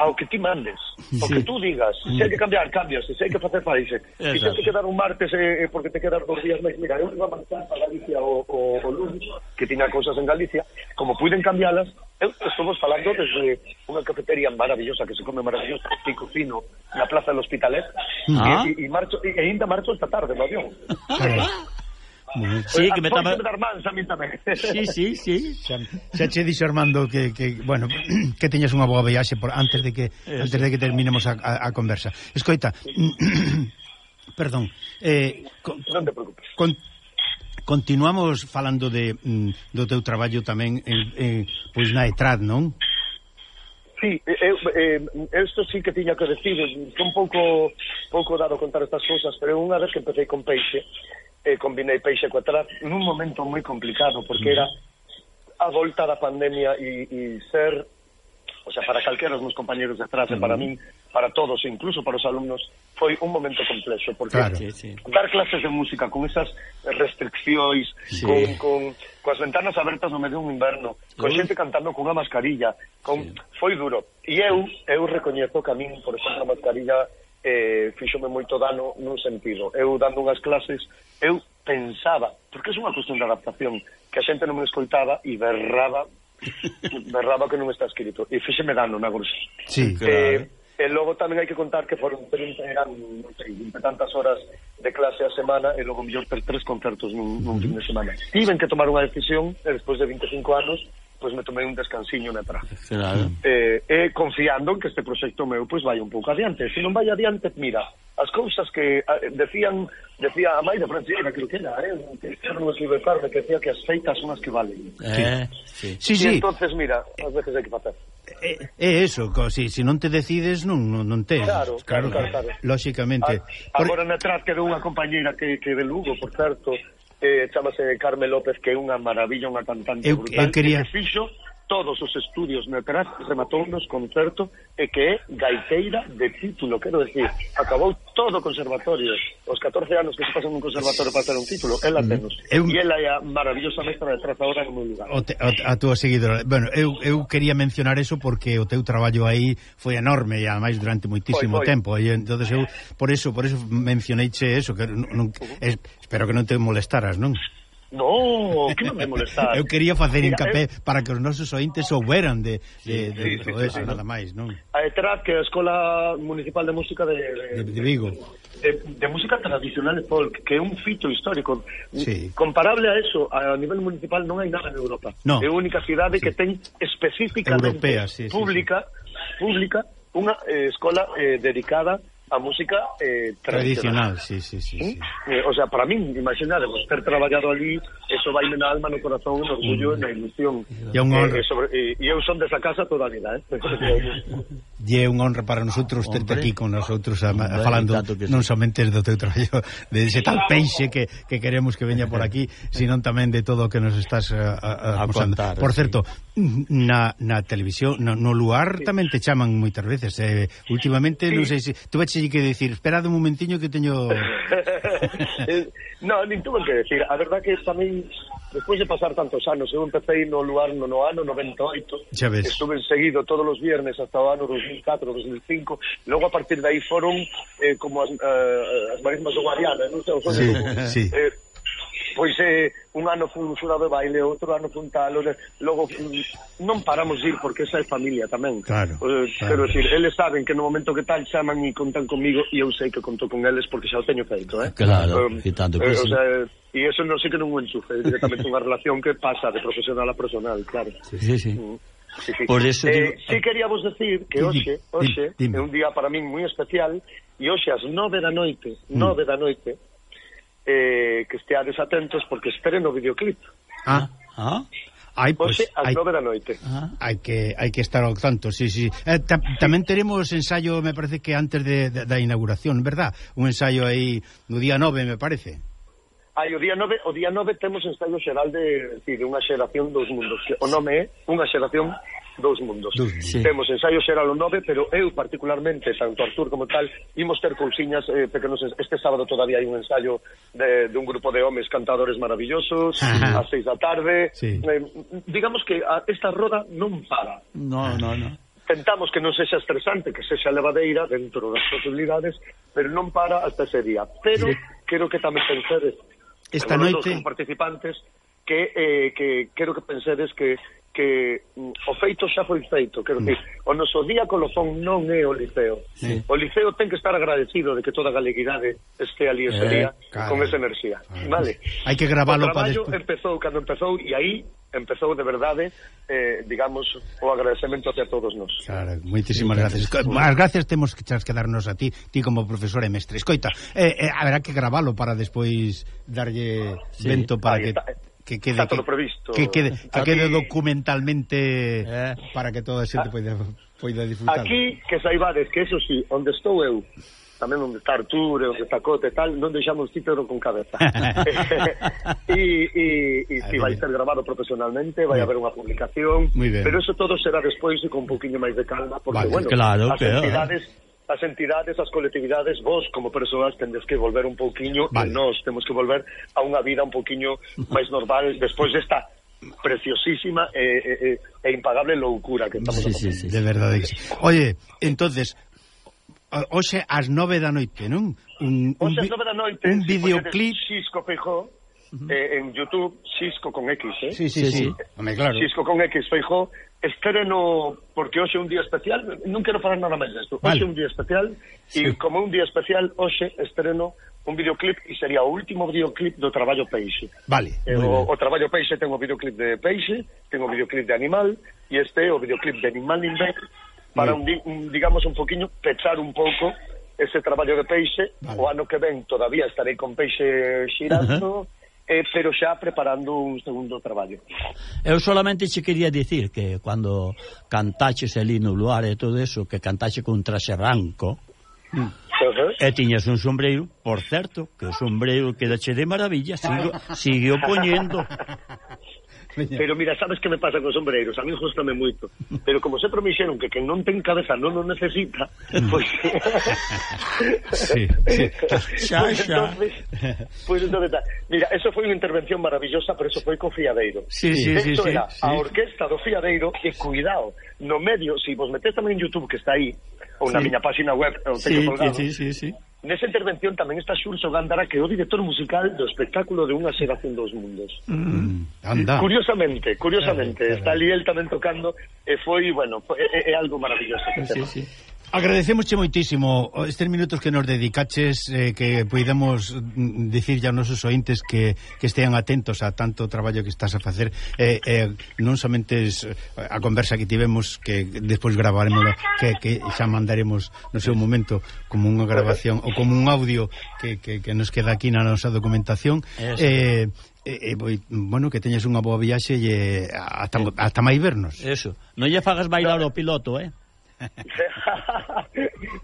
ao que ti mandes, o que tú digas. Se hai que cambiar, cambias, se hai que facer país, se hai que quedar un martes eh, porque te quedas dos días máis. Mira, eu iba a marchar para Galicia o, o, o lunes, que tiña cousas en Galicia, como puiden cambialas, eu estamos falando desde unha cafetería maravillosa que se come maravillosa, Pico Fino, na Plaza del Hospitalet, ah. e, e, marcho, e ainda marcho esta tarde no avión. Sí, que me estaba... Sí, sí, sí. Xa, xa che dixo Armando que, que bueno, que teñas unha boa viaxe por antes de que Eso. antes de que terminemos a, a, a conversa. Escoita, perdón, eh, con, non te preocupes. Con, continuamos falando de mm, do teu traballo tamén en, en, pois na ETRAD, non? Sí, eu, eh, esto sí que tiña que decir, un pouco pouco dado contar estas cousas, pero unha vez que empecé con Peixe, eh, combinei Peixe coa ETRAD nun momento moi complicado, porque era a volta da pandemia e, e ser, o sea, para calquera dos meus compañeros de ETRAD, uh -huh. para min, para todos, incluso para os alumnos, foi un momento complexo, porque claro. sí, sí. dar clases de música con esas restriccións, sí. con, con, coas ventanas abertas no medio dun inverno, con sí. xente cantando con unha mascarilla, con, sí. foi duro. E eu, eu recoñezo que a min, por exemplo, a mascarilla eh, fíxome moito dano nun sentido. Eu dando unhas clases, eu pensaba, porque é unha cuestión de adaptación, que a xente non me escoitaba e berraba berraba que non está escrito, e fíxeme dano na gruxa. Sí, claro. Eh, e logo tamén hai que contar que foron trinta, eran, non sei, vinte tantas horas de clase a semana, e logo mellor ter tres concertos nun, nun uh -huh. fin de semana. Tiven que tomar unha decisión, e despois de vinte e cinco anos, pois me tomei un descansiño na ETRAD. Claro. Eh, e confiando en que este proxecto meu pois vai un pouco adiante. Se non vai adiante, mira, as cousas que a, decían, decía a Maida Francieira, creo que era, eh, que era un escribe Carme, que decía que as feitas son as que valen. Eh, sí. Sí, sí. E entonces, mira, ás veces hai que facer. É, é eso, si, si non te decides non, non, non te claro, claro, claro, claro. Lóxicamente. A, agora na ETRAD quedou unha compañeira que, que de Lugo, por certo, eh, chamase Carme López, que é unha maravilla, unha cantante eu, brutal, eu quería... que fixo todos os estudios na ETRAD, rematou nos concerto, e que é gaiteira de título, quero decir, acabou todo o conservatorio, os catorce anos que se pasan nun conservatorio para ter un título, ela tenos, eu... e ela é a maravillosa mestra de ETRAD agora no meu lugar. O te, o, a túa seguidora. Bueno, eu, eu quería mencionar eso porque o teu traballo aí foi enorme e ademais durante moitísimo foi, foi. tempo, e entonces eu por eso, por eso mencioneiche eso, que non, non, uh -huh. es, espero que non te molestaras, non? No, que non me molestar. Eu quería facer hincapé eu... para que os nosos ointes souberan de, de, de, de sí, todo sí, eso, sí, nada máis, non? A ETRAD, que é a Escola Municipal de Música de, de, de Vigo. De, de música tradicional e folk, que é un fito histórico. Sí. Comparable a eso, a nivel municipal non hai nada en Europa. No. É a única cidade sí. que ten específicamente Europea, sí, pública, sí, sí. pública unha eh, escola eh, dedicada a música eh, tradicional. Tradicional, sí, sí, sí, sí. Eh, o sea, para min, imaginademos, ter traballado ali, eso vai na alma, no corazón, no orgullo, mm. na ilusión. E un honra. Eh, sobre, eh, e eu son desa casa toda a vida, eh? E é un honra para nosotros terte aquí con nosotros a, a, falando non somente do teu traballo, de ese tal Peixe que, que queremos que veña por aquí, sino tamén de todo o que nos estás a, a, a, a contar. Por certo, sí. na, na televisión, no, no lugar sí. tamén te chaman moitas veces. Eh, últimamente, sí. non sei se... Tú veches que decir, esperad un momentiño que teño... No, nin tuve que decir. A verdad que tamén, despois de pasar tantos anos, eu empecé no lugar no, no ano noventa e oito, estuve seguido todos os viernes hasta o ano dos mil catro, dos mil cinco, logo a partir de aí foron eh, como as, uh, as marismas do Guadiana, non sei, sí, como, sí. Eh, pois eh, un ano fun un xurado de baile, outro ano fun tal, logo non paramos de ir porque esa é familia tamén. Claro, eh, claro. Quero decir, eles saben que no momento que tal chaman e contan comigo e eu sei que conto con eles porque xa o teño feito, eh? Claro, um, e tanto que eh, sí. O sea, e eso non sei que non o enchufe, é directamente unha relación que pasa de profesional a personal, claro. Sí, sí, sí. Mm. Sí, sí. Por eso eh, digo... sí queríamos decir que hoxe, hoxe é un día para min moi especial e hoxe ás nove da noite, nove da noite, eh, que esteades atentos porque estreno o videoclip. Ah, ah. Ai, pues, hoxe ás nove da noite. Ah, hai que hai que estar ao tanto, sí, sí. Eh, ta, tamén teremos ensayo, me parece que antes de, de, da inauguración, verdad? Un ensayo aí no día nove, me parece. Ai, o día nove, o día nove temos ensayo xeral de, de, de unha xeración dos mundos. O nome é unha xeración dos mundos. Sí. Temos ensayo xeral o nove, pero eu particularmente, tanto Artur como tal, imos ter cousiñas eh, pequenos. Este sábado todavía hai un ensayo de, de un grupo de homes cantadores maravillosos, ás seis da tarde. Sí. Eh, digamos que a, esta roda non para. No, no, no. tentamos que non sexa estresante, que sexa levadeira dentro das posibilidades, pero non para hasta ese día. Pero sí. Quero que tamén pensedes, esta noite, como participantes, que, eh, que quero que pensedes que que mm, o feito xa foi feito, quero dicir, mm. o noso día colofón non é o Liceo. Sí. O Liceo ten que estar agradecido de que toda a galeguidade este ali ese eh, día claro. Con esa enerxía, ah, vale? Hai que gravalo para despois. Empezou cando empezou e aí empezou de verdade, eh, digamos, o agradecemento hacia todos nós. Claro, moitísimas gracias. As gracias temos que chas que darnos a ti, ti como profesor e mestre. Escoita, eh, eh, haberá que gravalo para despois darlle sí. vento para aí que... Está. Que quede, está todo previsto. Que quede, que quede documentalmente eh. para que toda a xente poida, poida disfrutar. Aquí, que saibades que eso sí, onde estou eu, tamén onde está Artur, onde está Cote e tal, non deixamos títere con cabeza. E, e, e si vai ser grabado profesionalmente, vai haber unha publicación, pero eso todo será despois e con un poquinho máis de calma, porque, vale, bueno, claro, as entidades... as entidades, as colectividades, vos como persoas tendes que volver un pouquiño vale. E nós temos que volver a unha vida un pouquiño máis normal despois desta preciosísima e, e, e impagable loucura que estamos sí, sí, sí, de verdade. Oye, entonces hoxe ás nove da noite, non? Un, un, ás nove da noite un videoclip Xisco Feijó uh-huh. eh, en YouTube, Xisco con X, eh? Sí, sí, sí, sí. Home, claro. Xisco con X Feijó. Estreno, porque hoxe é un día especial, non quero falar nada máis desto. Hoxe é un día especial, sí. E como un día especial, hoxe estreno un videoclip e sería o último videoclip do Traballo Peixe. Vale. Eh, o, o Traballo Peixe ten o videoclip de Peixe, ten o videoclip de Animal, e este é o videoclip de Animal Ninbec, para, un, un, digamos, un poquinho pechar un pouco ese traballo de Peixe. Vale. O ano que ven todavía estarei con Peixe xirando, uh-huh. Eh, pero xa preparando un segundo traballo. Eu solamente che quería dicir que cando cantaches ali no luar e todo eso, que cantache con un traxe branco, uh-huh. E tiñas un sombreiro, por certo, que o sombreiro quedache de maravilla, sigo, sigue o poñendo. Pero mira, sabes que me pasa con sombreiros? A mí gustame moito. Pero como sempre me dixeron que quen non ten cabeza non o necesita, pois... sí, sí. Xa, pues xa. Entonces, pues entonces, mira, eso foi unha intervención maravillosa, pero eso foi co Fiadeiro. Sí, sí, sí, Esto sí, era sí. A orquesta do Fiadeiro, e cuidado, no medio, si vos metes tamén en YouTube, que está aí, ou na sí. miña página web, o sí, teño colgado, sí, sí, sí. Nesa intervención tamén está Xurxo Gándara, que é o director musical do espectáculo de Unha xeración dos mundos. Mm, anda. Curiosamente, curiosamente, claro, claro. Está ali el tamén tocando, e foi, bueno, é, é algo maravilloso. Sí, sí. Agradecemosche moitísimo estes minutos que nos dedicaches, eh, que poidamos dicir ya aos nosos ointes que, que estean atentos a tanto traballo que estás a facer, eh, eh, non somente a conversa que tivemos, que despois gravaremos, que, que xa mandaremos no seu momento como unha grabación ou como un audio que, que, que nos queda aquí na nosa documentación. Eh, eh, bueno, que teñes unha boa viaxe e hasta, hasta máis vernos. Eso, non lle fagas bailar o piloto, eh?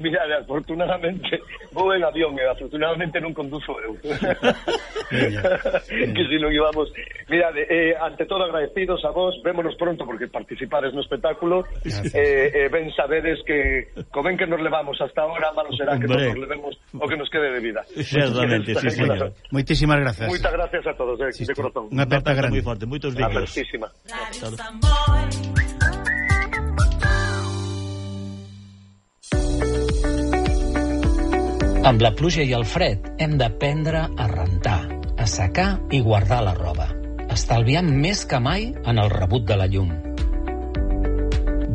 Mira, afortunadamente vou en avión e afortunadamente non conduzo eu. Que si non íbamos. Mira, eh, ante todo agradecidos a vos, vémonos pronto porque participades no espectáculo. eh, eh, Ben sabedes que co ben que nos levamos hasta ahora, malo será que nos levemos o que nos quede de vida. Certamente, sí, señor. Moitísimas gracias. Moitas gracias a todos, eh, sí, de corazón. Unha aperta grande. Moi forte, moitos vídeos. Apertísima. Amb la pluja i el fred hem d'aprendre a rentar, a secar i guardar la roba, estalviant més que mai en el rebut de la llum.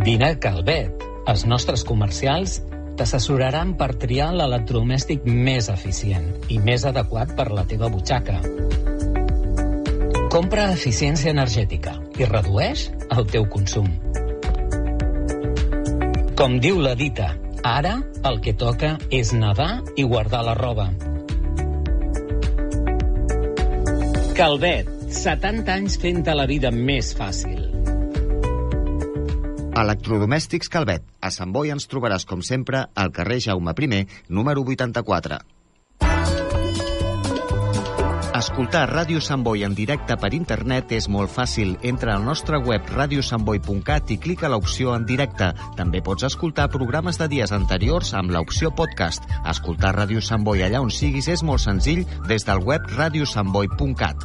Vine a Calvet. Els nostres comercials t'assessoraran per triar l'electrodomèstic més eficient i més adequat per la teva butxaca. Compra eficiència energètica i redueix el teu consum. Com diu la dita, ara el que toca és nedar i guardar la roba. Calvet, setanta anys fent-te la vida més fàcil. Electrodomèstics Calvet. A Sant Boi ens trobaràs, com sempre, al carrer Jaume primer, número vuitanta-quatre. Escoltar Ràdio Sant Boi en directe per internet és molt fàcil. Entra al nostre web radio sant boi punt cat i clica l'opció en directe. També pots escoltar programes de dies anteriors amb l'opció podcast. Escoltar Ràdio Sant Boi allà on siguis és molt senzill des del web radio sant boi punt cat.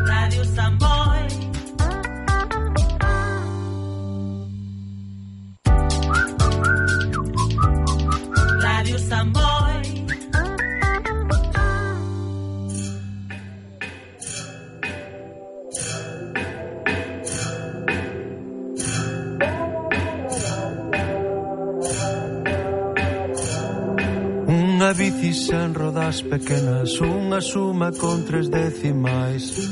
Ràdio Sant Boi. unha bici sen rodas pequenas, unha suma con tres decimais,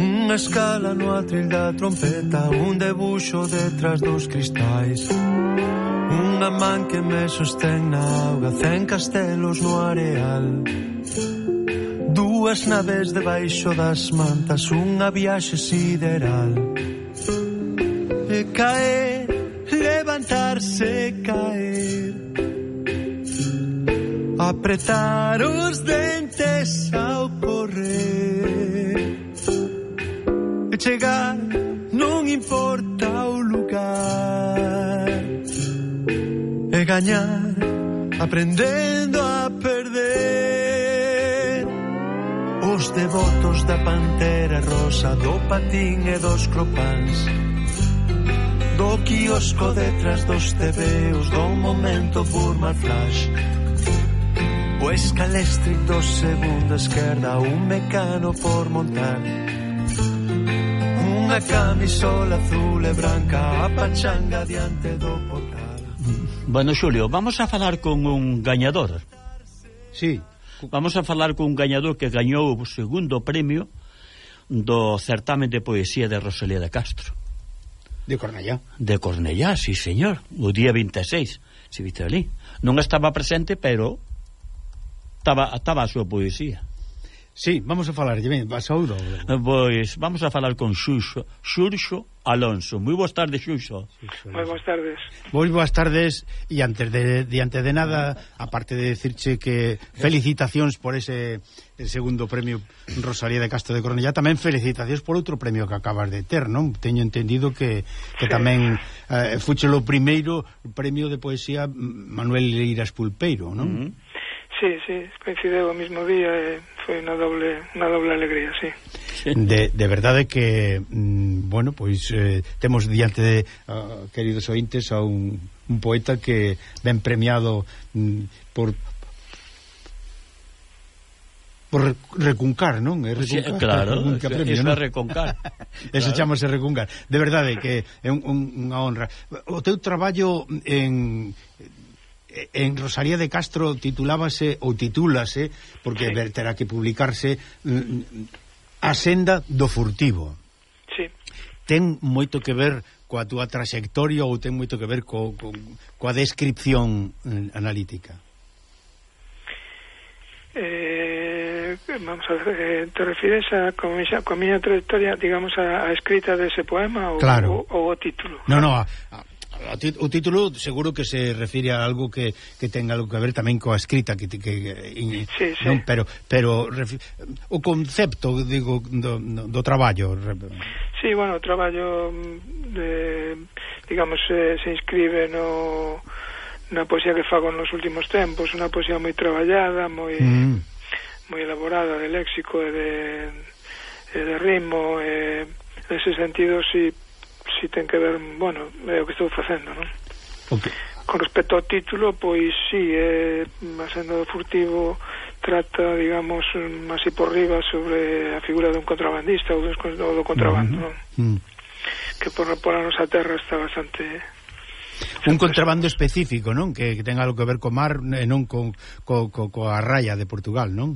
unha escala no atril da trompeta, un debuxo detrás dos cristais, unha man que me sostén na auga, cen castelos no areal, dúas naves debaixo das mantas, unha viaxe sideral. E caer, levantarse, caer, apretar os dentes ao correr, e chegar, non importa o lugar, e gañar, aprendendo a perder. Os devotos da pantera rosa, do patín e dos cropáns, do quiosco detrás dos tebeos, do momento Burma Flash, o escalestri do segundo esquerda, un mecano por montar, unha camisola azul e branca, a pachanga diante do portal. Bueno, Xulio, vamos a falar con un gañador. Sí. Vamos a falar con un gañador que gañou o segundo premio do certamen de poesía de Rosalía de Castro. De Cornellá. De Cornellá, sí, señor. O día vinte e seis, se viste ali. Non estaba presente, pero estaba, estaba a súa poesía. Sí, vamos a falar, ben, vas a ouro. Pois vamos a falar con Xuxo, Xurxo Alonso. Moi boas tardes, Xuxo. Moi boas tardes. Moi boas tardes, e antes de diante de nada, aparte de decirche que felicitacións por ese el segundo premio Rosalía de Castro de Cornellá, tamén felicitacións por outro premio que acabas de ter, non? Teño entendido que, que sí. tamén eh, fuche o primeiro premio de poesía Manuel Leiras Pulpeiro, non? Mm-hmm. Sí, sí, coincideu o mismo día e foi unha doble unha doble alegría, sí. De, de verdade que mm, bueno, pois eh, temos diante de uh, queridos ointes a un, un poeta que ben premiado mm, por por recuncar, non? É recuncar, sí, claro, recuncar eso, premio, eso non? é recuncar. Eso claro. chamase recuncar. De verdade que é un, un, unha honra. O teu traballo en en Rosalía de Castro titulábase ou titúlase, porque sí. terá que publicarse, A senda do furtivo. Sí. Ten moito que ver coa túa traxectoria ou ten moito que ver co, co, coa descripción eh, analítica? Eh, vamos a ver, eh, te refires a con a miña trayectoria, digamos, a, a escrita dese poema ou, claro. o, o título? No, no, a, a o título seguro que se refire a algo que, que tenga algo que ver tamén coa escrita que, que, que sí, sí. Non, pero pero o concepto, digo, do, do traballo. Sí, bueno, o traballo de, digamos, se, se inscribe no na poesía que fago nos últimos tempos, unha poesía moi traballada, moi mm. moi elaborada de léxico e de, e de ritmo, e nese sentido si si ten que ver, bueno, é o que estou facendo, non? Okay. Con respecto ao título, pois sí, é, a senda do furtivo trata, digamos, así por riba sobre a figura dun contrabandista ou do, ou do contrabando, non? Mm. Que por, por a nosa terra está bastante... Un contrabando específico, non? Que, que ten algo que ver co mar e non con, co, co, coa raya de Portugal, non?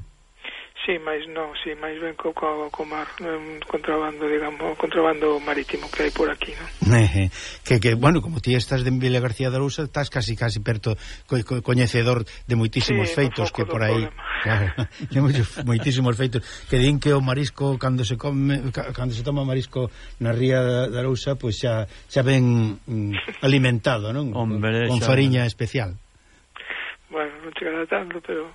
Sí, máis non, sí, máis ben co, co, co mar, un contrabando, digamos, contrabando marítimo que hai por aquí, non? Eh, que, que, bueno, como ti estás de Vila García de Arousa, estás casi, casi perto, co, co, coñecedor de moitísimos sí, feitos que por aí... Claro, de moitísimos feitos, que din que o marisco, cando se come, cando se toma marisco na ría de Arousa, pois pues xa, xa ben mm, alimentado, non? Hombre, con xa... fariña especial. Bueno, non chegará tanto, pero...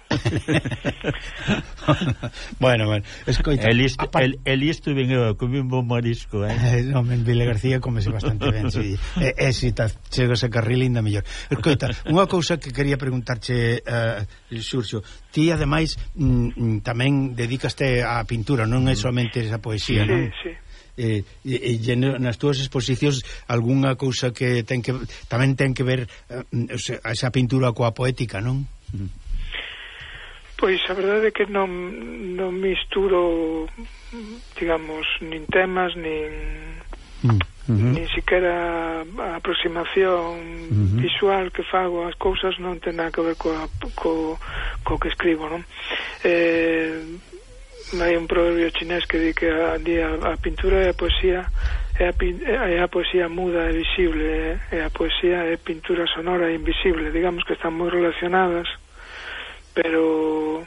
bueno, bueno, escoita... El isto, el, el isto vengo a comer un bon marisco, eh? eh non, en Vila García comese bastante ben, si, e, e si ta, chegas a Carril ainda mellor. Escoita, unha cousa que quería preguntarche, uh, Xurxo, ti ademais mm, tamén dedicaste á pintura, non é somente esa poesía, sí, non? Sí, sí. Eh, e, e nas túas exposicións algunha cousa que ten que tamén ten que ver uh, esa pintura coa poética, non? Pois a verdade é que non, non misturo, digamos, nin temas nin mm. Uh-huh. Ni siquiera a aproximación uh-huh. visual que fago as cousas non ten nada que ver coa, co, co que escribo, non? Eh, hai un proverbio chinés que di que a, a, a pintura e a poesía é a, é a poesía muda e visible, e a poesía é pintura sonora e invisible, digamos que están moi relacionadas, pero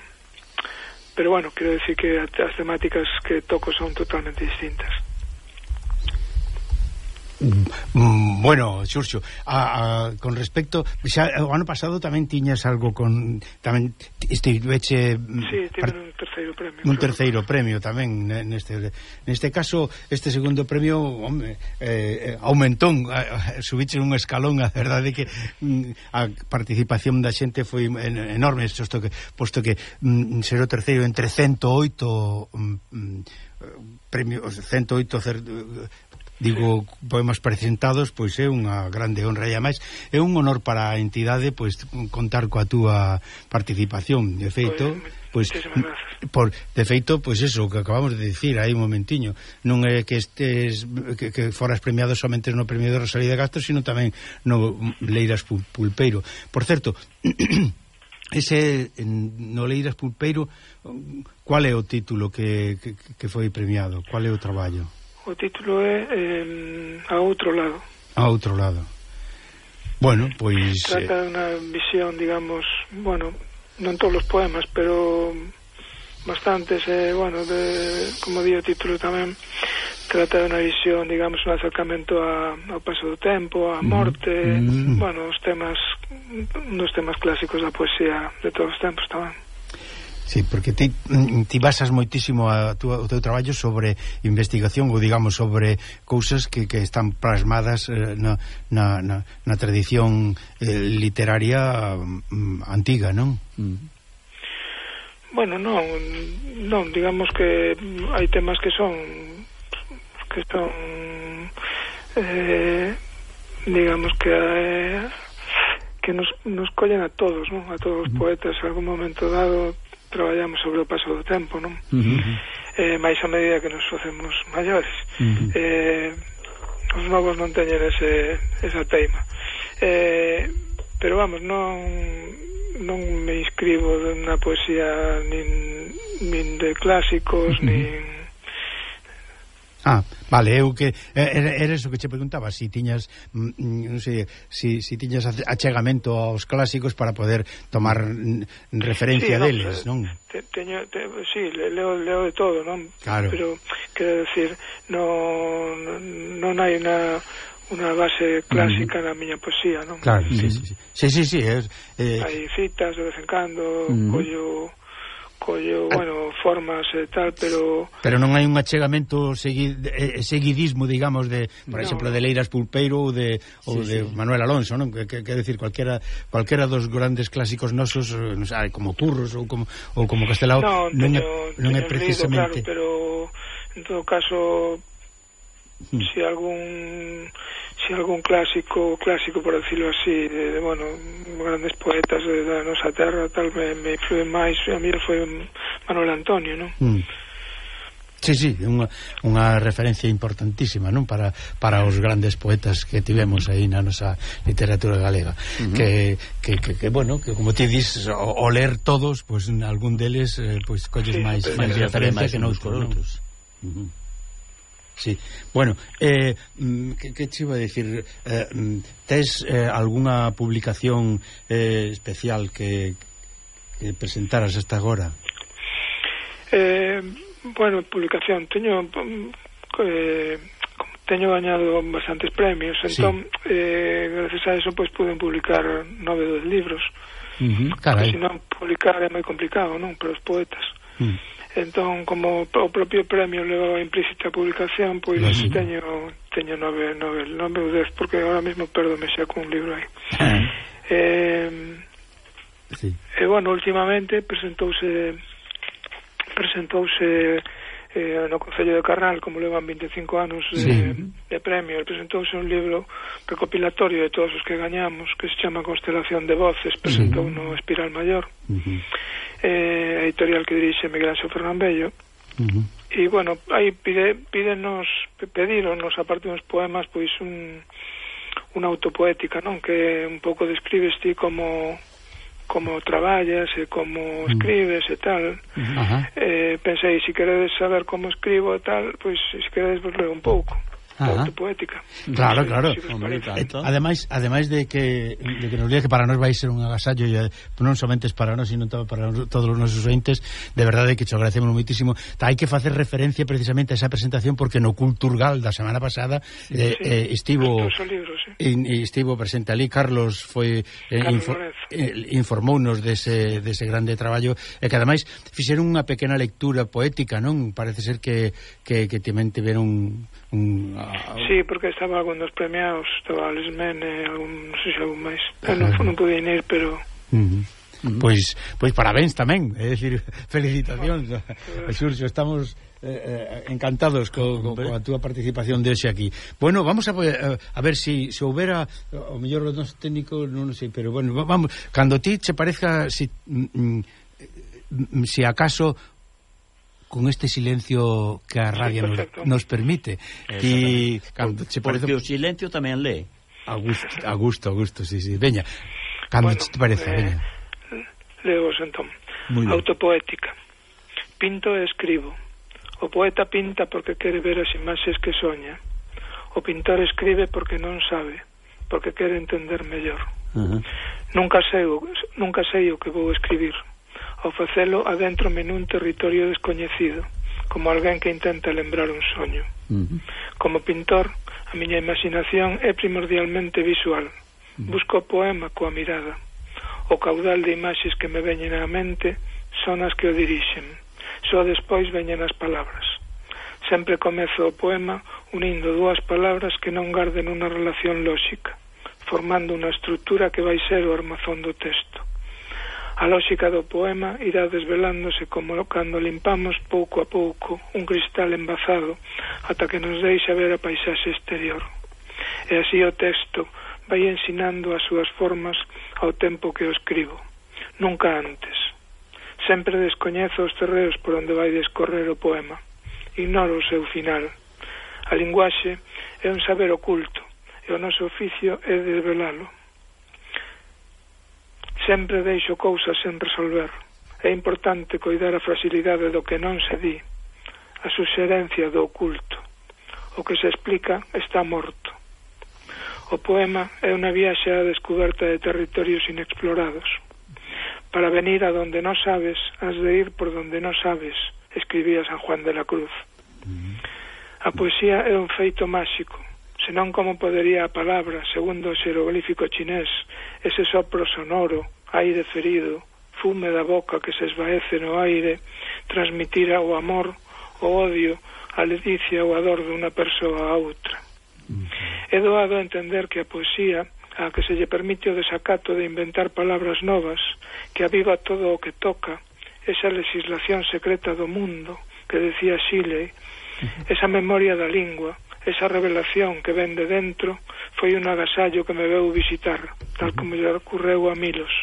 pero bueno, quero decir que as temáticas que toco son totalmente distintas. Bueno, Xurxo, a, a, con respecto xa, o ano pasado tamén tiñas algo con tamén estiveche sí, tiven un terceiro premio un terceiro premio tamén neste neste caso, este segundo premio home, eh, aumentou subiche un escalón, a verdade que a participación da xente foi enorme, posto que, posto que mm, ser o terceiro entre ciento oito mm, premios, ciento oito cer, digo, poemas presentados, pois é unha grande honra e ademais é un honor para a entidade pois contar coa túa participación. De feito, pois por de feito, pois eso que acabamos de dicir aí un momentiño, non é que estes que, que foras premiado somente no premio de Rosalía de Castro, sino tamén no Leiras Pulpeiro. Por certo, ese no Leiras Pulpeiro, cual é o título que, que, que foi premiado? Cual é o traballo? O título é eh, A Outro Lado. A Outro Lado. Bueno, pois... Trata de unha visión, digamos, bueno, non todos os poemas, pero bastantes, eh, bueno, de, como di o título tamén, trata de unha visión, digamos, un acercamento a, ao paso do tempo, a morte, mm. bueno, os temas, uns temas clásicos da poesía de todos os tempos tamén. Sí, porque ti, ti basas moitísimo a tu, o teu traballo sobre investigación ou digamos sobre cousas que, que están plasmadas eh, na, na, na, na tradición eh, literaria mm, antiga, non? Mm. Bueno, non, non, digamos que hai temas que son que son eh, digamos que eh, que nos, nos collen a todos, non? A todos os poetas en algún momento dado traballamos sobre o paso do tempo, non? Uh-huh. Eh, máis a medida que nos facemos maiores. Uh-huh. Eh, os novos non teñen ese, esa teima. Eh, pero vamos, non non me inscribo na poesía nin, nin de clásicos, uh-huh. nin... Ah, vale, eu que era, era eso que che preguntaba, si tiñas non sei, si, si tiñas achegamento aos clásicos para poder tomar referencia sí, no, deles, non? Te, teño, te, sí, leo, leo de todo, non? Claro. Pero, quero decir, non, non hai unha unha base clásica uh-huh. na miña poesía, non? Claro, uh-huh. sí, sí, sí. Sí, sí, sí, es, eh... hai citas de vez en cando, uh-huh. collo... collo, bueno, formas e tal, pero... Pero non hai un achegamento segui, eh, seguidismo, digamos, de, por no, exemplo, de Leiras Pulpeiro ou de, ou sí, de sí. Manuel Alonso, non? Que, que, que decir, cualquera, cualquera dos grandes clásicos nosos, non sei, como Curros ou como, ou como Castelao, no, non, teño, é, non é precisamente... Claro, pero, en todo caso, hmm. si algún... si algún clásico, clásico por decirlo así, de, de bueno, grandes poetas de, da nosa terra, tal, me, me influen máis, a mí foi Manuel Antonio, non? Mm. Sí, sí, unha, unha referencia importantísima, non? Para, para os grandes poetas que tivemos aí na nosa literatura galega. Uh-huh. Que, que, que, que, bueno, que como ti dis, o, o ler todos, pois pues, algún deles, eh, pois pues, colles sí, máis, máis referencia que noutros, non? Uh-huh. Sí, bueno, eh, que, que te iba a decir, eh, tes eh, algunha publicación eh, especial que, que presentaras hasta agora? Eh, bueno, publicación, teño eh, teño gañado bastantes premios, entón, sí. eh, gracias a eso, pois, pues, pude publicar nove dos libros. Uh-huh, carai. Se non publicar é moi complicado, non? Para os poetas. Uh-huh. Entón, como o propio premio levaba implícita publicación, pois sí. teño teño nove, nove, nove ou dez, porque ahora mesmo perdome xa con un libro aí. Ah. Eh, sí. E, bueno, últimamente presentouse presentouse eh, no Concello de Carral, como levan vinte e cinco anos de, sí. de premio, presentouse un libro recopilatorio de todos os que gañamos, que se chama Constelación de Voces, presentou sí. no Espiral Maior. Uh-huh. Eh, a editorial que dirixe Miguel Ángel Fernán Bello, Uh-huh. E, bueno, aí pide, pídenos, pedironos, aparte dos poemas, pois un, unha autopoética, non? Que un pouco describes ti como como traballas e como escribes e tal. Uh-huh. eh, pensei, se queredes saber como escribo e tal, pois se queredes vos leo un pouco. Autopoética. Claro, claro. Ademais, ademais de que de que nos diga que para nós vai ser un agasallo, e non somente para nós, sino para todos os nosos ointes, de verdade que te agradecemos moitísimo. Hai que facer referencia precisamente a esa presentación, porque no Culturgal da semana pasada sí, eh, sí. Eh, estivo libros, sí. in, estivo presente ali. Carlos foi eh, info, eh, informounos dese, dese grande traballo, e que ademais fixeron unha pequena lectura poética, non? Parece ser que que, que tamén tiveron un sí, porque estaba algún dos premiados, estaba Lesmen e algún, non sei se algún máis. Eu non, non pude ir, pero uh-huh. Uh-huh. Pois, pois parabéns tamén, é dicir, felicitacións uh-huh. Xurxo, estamos eh, encantados co, co, co a túa participación de hoxe aquí. Bueno, vamos a, a ver se si, si houbera o mellor os nosos técnicos, non sei, pero bueno, vamos, cando ti che parezca si, mm, si acaso con este silencio que a radio sí, nos, nos permite. Y cando che parece... Porque o silencio tamén lee. A gusto, a gusto, a gusto, sí, sí. Veña, cando bueno, te parece, eh, veña. Leos entón. Autopoética. Pinto e escribo. O poeta pinta porque quere ver as imaxes que soña. O pintor escribe porque non sabe, porque quere entender mellor. Uh-huh. Nunca sei, nunca sei o que vou escribir. Ao facelo adéntrome nun territorio descoñecido, como alguén que intenta lembrar un soño. Uh-huh. Como pintor, a miña imaginación é primordialmente visual. Uh-huh. Busco o poema coa mirada. O caudal de imaxes que me veñen á mente son as que o dirixen. Só despois veñen as palabras. Sempre comezo o poema unindo dúas palabras que non garden unha relación lóxica, formando unha estrutura que vai ser o armazón do texto. A lógica do poema irá desvelándose como cando limpamos pouco a pouco un cristal embazado ata que nos deixa ver a paisaxe exterior. E así o texto vai ensinando as súas formas ao tempo que o escribo. Nunca antes. Sempre descoñezo os terreos por onde vai descorrer o poema. Ignoro o seu final. A linguaxe é un saber oculto e o noso oficio é desvelalo. Sempre deixo cousas sen resolver. É importante coidar a fragilidade do que non se di, a suxerencia do oculto. O que se explica está morto. O poema é unha viaxe á descoberta de territorios inexplorados. Para venir a donde non sabes, has de ir por donde non sabes, escribía San Juan de la Cruz. A poesía é un feito máxico, senón como podería a palabra, segundo o xeroglífico chinés, ese sopro sonoro, aire ferido, fume da boca que se esvaece no aire, transmitir o amor, o odio, a ledicia ou a dor dunha persoa a outra. É doado entender que a poesía, a que se lle permite o desacato de inventar palabras novas, que aviva todo o que toca, esa legislación secreta do mundo, que decía Shelley, esa memoria da lingua, esa revelación que ven de dentro, foi un agasallo que me veu visitar, tal como lle ocorreu a Milos.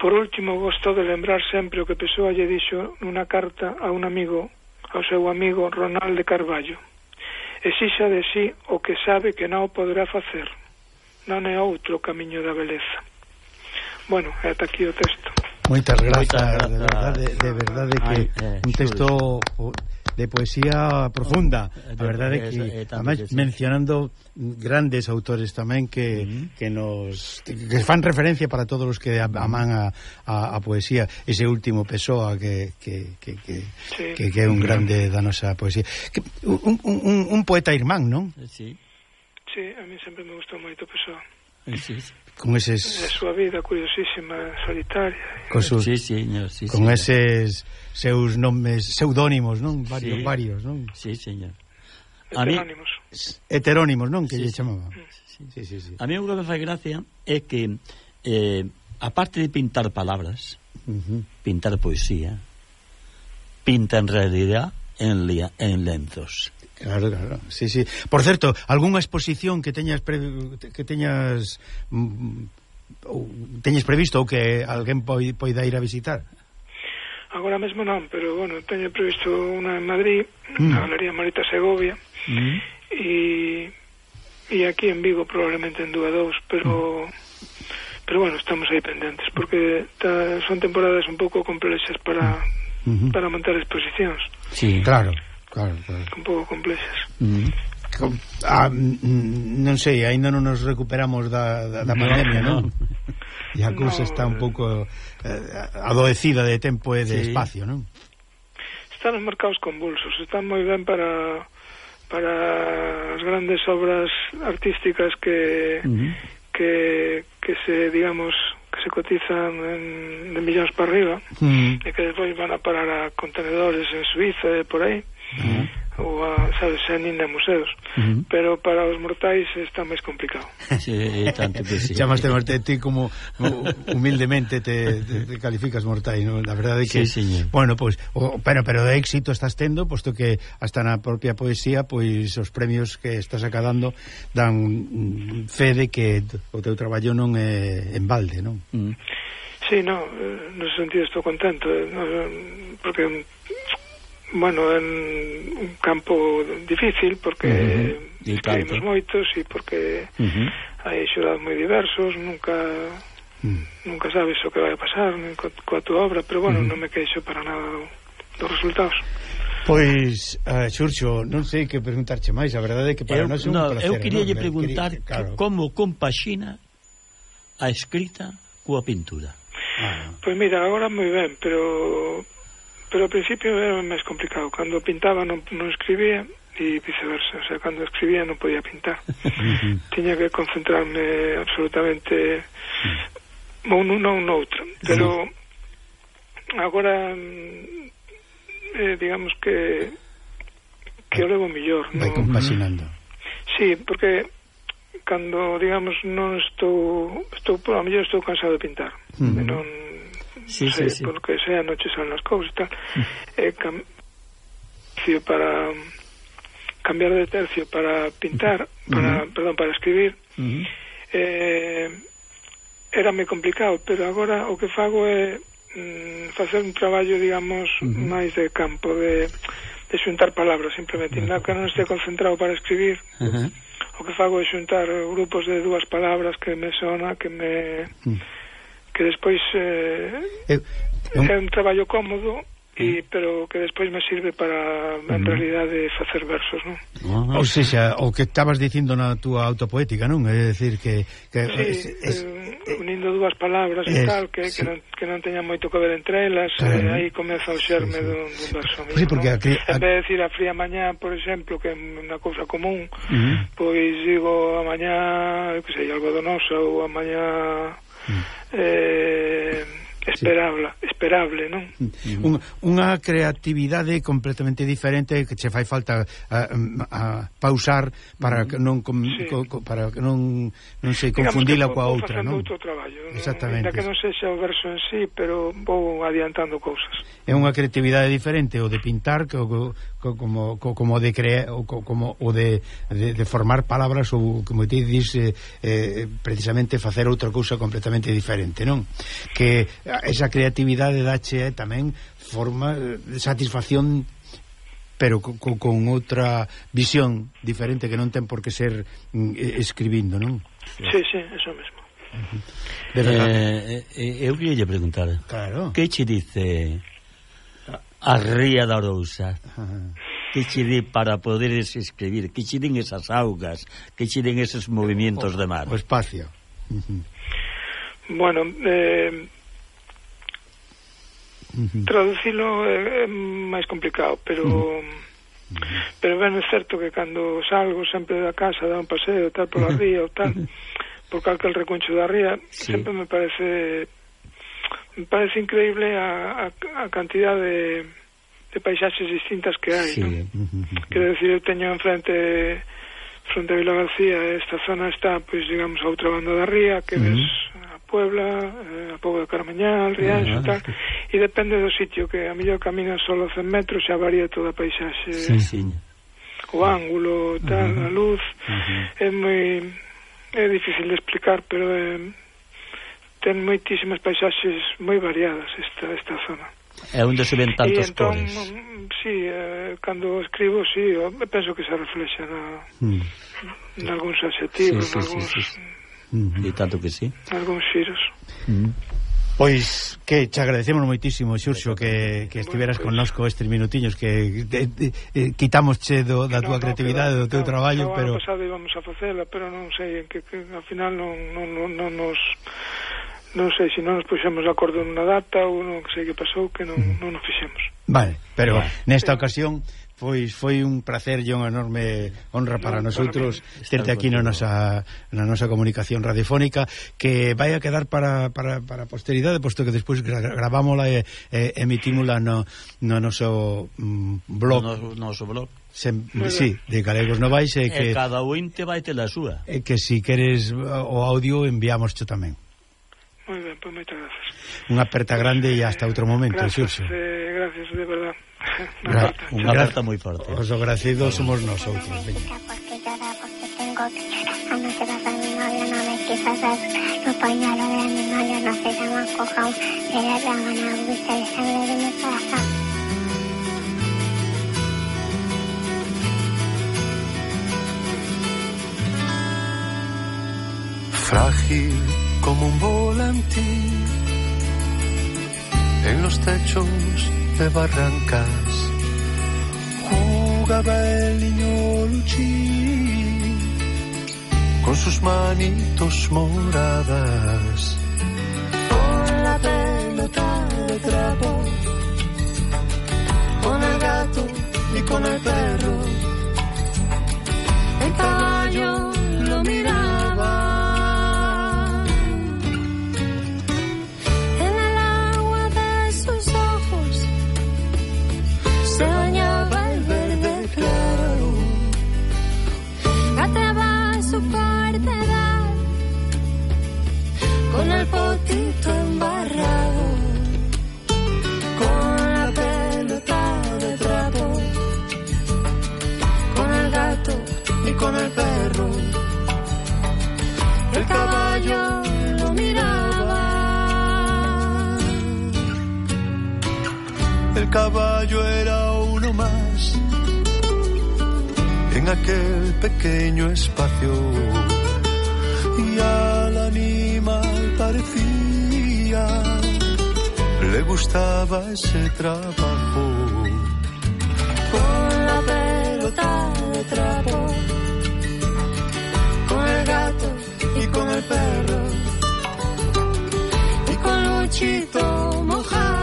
Por último, gosto de lembrar sempre o que Pessoa lle dixo nunha carta a un amigo, ao seu amigo Ronald de Carballo. Exixa de sí o que sabe que non o poderá facer. Non é outro camiño da beleza. Bueno, é ata aquí o texto. Moitas grazas, de verdade, de verdade que un texto de poesía profunda, a verdade que además mencionando grandes autores tamén que uh-huh. que nos que fan referencia para todos os que aman a, a, a poesía. Ese último Pessoa que que, que, que, sí. que, que é un grande da nosa poesía. Que, un, un, un poeta irmán, non? Sí. Sí, a mí sempre me gustou moito Pessoa. Sí, sí. Con eses... A súa vida curiosísima, solitaria. Con, sus... sí, señor, sí, con señor. eses seus nomes pseudónimos, non? Varios, sí. varios, non? Sí, señor. Heterónimos. Heterónimos, non? Que sí, lle chamaba. Sí. Sí, sí, sí. A mí o que me fai gracia é que eh, aparte de pintar palabras, uh-huh. pintar poesía, pinta en realidad en, lia, en lenzos. Claro, claro, sí, sí. Por certo, algunha exposición que teñas pre... que teñas mm, teñas previsto ou que alguén poida ir a visitar? agora mesmo non, pero, bueno, teño previsto unha en Madrid, mm. na Galería Marita Segovia, mm. e, e aquí en Vigo probablemente en dúa dous, pero... Mm. Pero, bueno, estamos aí pendentes, porque ta, son temporadas un pouco complexas para, mm. para montar exposicións. Sí, claro, claro, claro. Un pouco complexas. Mm. Ah, non sei, aínda non nos recuperamos da, da, da pandemia, non? E a cousa no, está un pouco eh, adoecida de tempo e de sí. espacio, non? Están os mercados convulsos, están moi ben para para as grandes obras artísticas que uh-huh. que, que se, digamos, que se cotizan en, de millóns para arriba uh-huh. e que despois van a parar a contenedores en Suiza e por aí. Uh-huh. Ou a, sabes, xa nin a museos uh-huh. pero para os mortais está máis complicado. Sí, tanto que sí. Chamaste mortais, ti como humildemente te, te, te calificas mortais, ¿no? La verdade é que, sí, bueno, pues, o, pero, pero de éxito estás tendo, posto que hasta na propia poesía, pois os premios que estás acadando dan fe de que o teu traballo non é en balde, non? Mm. Sí, no, no sentido estou contento, no, porque bueno, en un campo difícil porque uh-huh. escribimos moitos e porque uh-huh. hai xurados moi diversos, nunca uh-huh. nunca sabes o que vai a pasar co, coa tua obra, pero bueno, uh-huh. non me queixo para nada do, dos resultados. Pois, uh, Xurxo, non sei que preguntarche máis, a verdade é que para eu, nós é un no, placer. Eu queria lle preguntar quería, claro. como compaxina a escrita coa pintura. Ah. Pois mira, agora moi ben, pero pero ao principio era máis complicado. Cando pintaba non, non escribía e viceversa, o sea, cando escribía non podía pintar. Tiña que concentrarme absolutamente ou nun ou noutro, pero agora eh, digamos que que o levo mellor, vai no? compaxinando. Sí, porque cando, digamos, non estou estou, por a mellor estou cansado de pintar, mm. non sí, sei, sí, sí. porque sea noche son las cousas e tal, eh, cam para cambiar de tercio para pintar, para, uh-huh. perdón, para escribir, uh-huh. eh, era moi complicado, pero agora o que fago é mm, facer un traballo, digamos, uh-huh. máis de campo, de, de xuntar palabras, simplemente, uh-huh. que non este concentrado para escribir, uh-huh. o que fago é xuntar grupos de dúas palabras que me sona, que me... Uh-huh. que despois eh, eu, eu... é un traballo cómodo e, pero que despois me sirve para en uh-huh. realidade facer versos, non? Uh-huh. Ou seja, o que estabas dicindo na túa autopoética, non? É dicir que, que sí, es, es, eh, unindo dúas palabras es, e tal que, sí. que, non, que non teñan moito que ver entre elas, claro. eh, aí comeza o xerme sí, sí. dun, dun verso mismo, sí, porque ¿no? a, a... En vez de decir a fría mañá, por exemplo, que é unha cousa común, uh-huh. pois digo a mañá, que sei, algodonosa, ou a mañá eh, esperable, sí. esperable, non? Un, unha creatividade completamente diferente que che fai falta a, a pausar para que non com, sí. co, co, para que non non se confundila coa outra, non? Outro traballo, exactamente. Ainda que non sexa o verso en sí, pero vou adiantando cousas. É unha creatividade diferente o de pintar que o, co, como co, como de crear o co, como o de, de, de formar palabras ou como te dis eh, eh, precisamente facer outra cousa completamente diferente, non? Que esa creatividade dache eh, tamén forma de satisfacción, pero co, co, con outra visión diferente que non ten por que ser mm, escribindo, non? Sí, sí, eso mesmo. Uh-huh. De eh, eh, eu queria preguntar, claro. Que che dice a ría da Arousa? Uh-huh. Que che di para poder escribir? Que che din esas augas? Que che din esos movimentos o, de mar? O espacio. Uh-huh. Bueno, eh, uh-huh. traducilo é, é máis complicado, pero uh-huh. pero ben é certo que cando salgo sempre da casa, da un paseo tal pola ría ou tal, por calquel recuncho da ría, sí. sempre me parece me parece increíble a, a, a cantidad de, de paisaxes distintas que hai, sí. ¿no? Uh-huh. Quero decir, eu teño enfrente fronte a Vila García, esta zona está, pois, digamos, a outra banda da ría, que uh-huh. ves a Puebla, eh, a Pobo de Carmeñal, Rianxo, uh-huh. tal, e depende do sitio, que a mellor caminas solo cen metros, xa varía toda a paisaxe, sí, sí. o ángulo, tal, uh-huh. a luz, uh-huh. é moi é difícil de explicar, pero é ten moitísimas paisaxes moi variadas esta, esta zona. É onde se ven tantos entón, cores. Sí, eh, cando escribo, sí, eu penso que se reflexa na, mm. en algúns adxetivos, sí, sí, algúns, sí, sí. Mm. E tanto que sí. Algúns xiros. Mm. Pois que te agradecemos moitísimo, Xurxo, que, que estiveras bueno, pues, connosco estes minutiños que de, de, de, quitamosche do, da túa no, creatividade, do teu no, traballo, no, pero... No, pasado íbamos a facela, pero non sei, que, que ao final non, non, non, non nos... Non sei, se non nos puxemos de acordo nunha data ou non sei que pasou, que non, mm. non nos fixemos. Vale, pero vale. Nesta sí. ocasión... Pois foi un placer e unha enorme honra para no, nosotros terte aquí na nosa, na nosa comunicación radiofónica, que vai a quedar para, para, para a posteridade, posto que despois gra gravámola e, e emitímola no, no noso mm, blog. No noso blog. Se, sí, de Galegos Novais e que e cada ointe vai ter a súa. E que si queres o audio enviamos tamén. Moi ben, pois moitas gracias. Unha aperta grande e hasta outro momento, Gracias, eh, gracias, de verdad. Gra Unha aperta moi forte. Os agradecidos somos nosotros. Porque llora, porque tengo que llorar. Anoche vas a mi novio, no me quisas ver. Los pañuelos de mi novio no se llaman cojón. Se le llaman agüita de sangre de mi corazón. Frágil como un volantín en los techos de barrancas jugaba el niño Luchín con sus manitos moradas, con la pelota de trapo, con el gato y con el perro. El caballo lo miraba. Se bañaba el verde claro, ataba su cartera con el potito embarrado, con la pelota de trapo, con el gato y con el perro. El caballo lo miraba. El caballo era uno más en aquel pequeño espacio y al animal parecía le gustaba ese trabajo. Con la pelota de trapo, con el gato y con el perro y con Luchito mojado.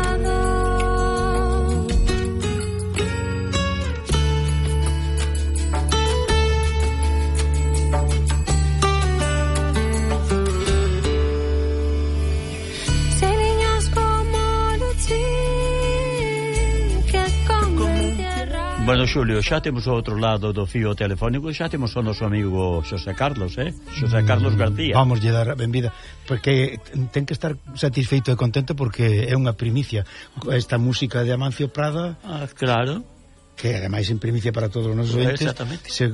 Bueno, Xulio, xa temos o outro lado do fío telefónico, xa temos o noso amigo Xosé Carlos, eh? Xosé Carlos García. Vamos lle dar a benvida, porque ten que estar satisfeito e contento porque é unha primicia esta música de Amancio Prada. Ah, claro. Que ademais en primicia para todos os nosos entes se,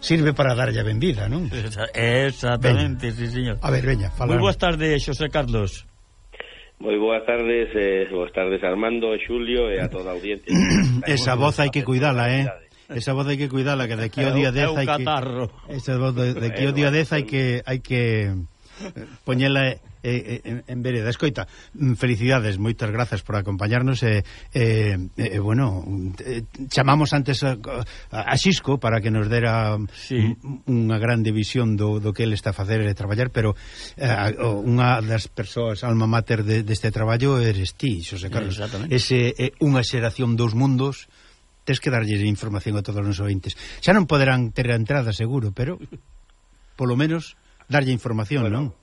sirve para darlle a benvida, non? Exactamente, veña. Sí, señor. A ver, veña, fala. Moi boas tardes, Xosé Carlos. Moi boas tardes, eh, boas tardes Armando, Xulio e a toda a audiencia. Esa voz hai que cuidala, eh? Esa voz hai que cuidala, que de aquí ao día dez hai que esa voz de, de aquí ao día dez hai que hai que poñela eh, en, en vereda. Escoita, felicidades, moitas grazas por acompañarnos e eh, eh, eh, bueno, eh, chamamos antes a, a Xisco para que nos dera sí. unha grande visión do, do que ele está a facer e traballar, pero eh, unha das persoas alma mater de, deste traballo eres ti, Xosé Carlos. Ese eh, unha xeración dos mundos, tes que darlle información a todos os ointes. Xa non poderán ter a entrada seguro, pero polo menos darlle información, bueno, non?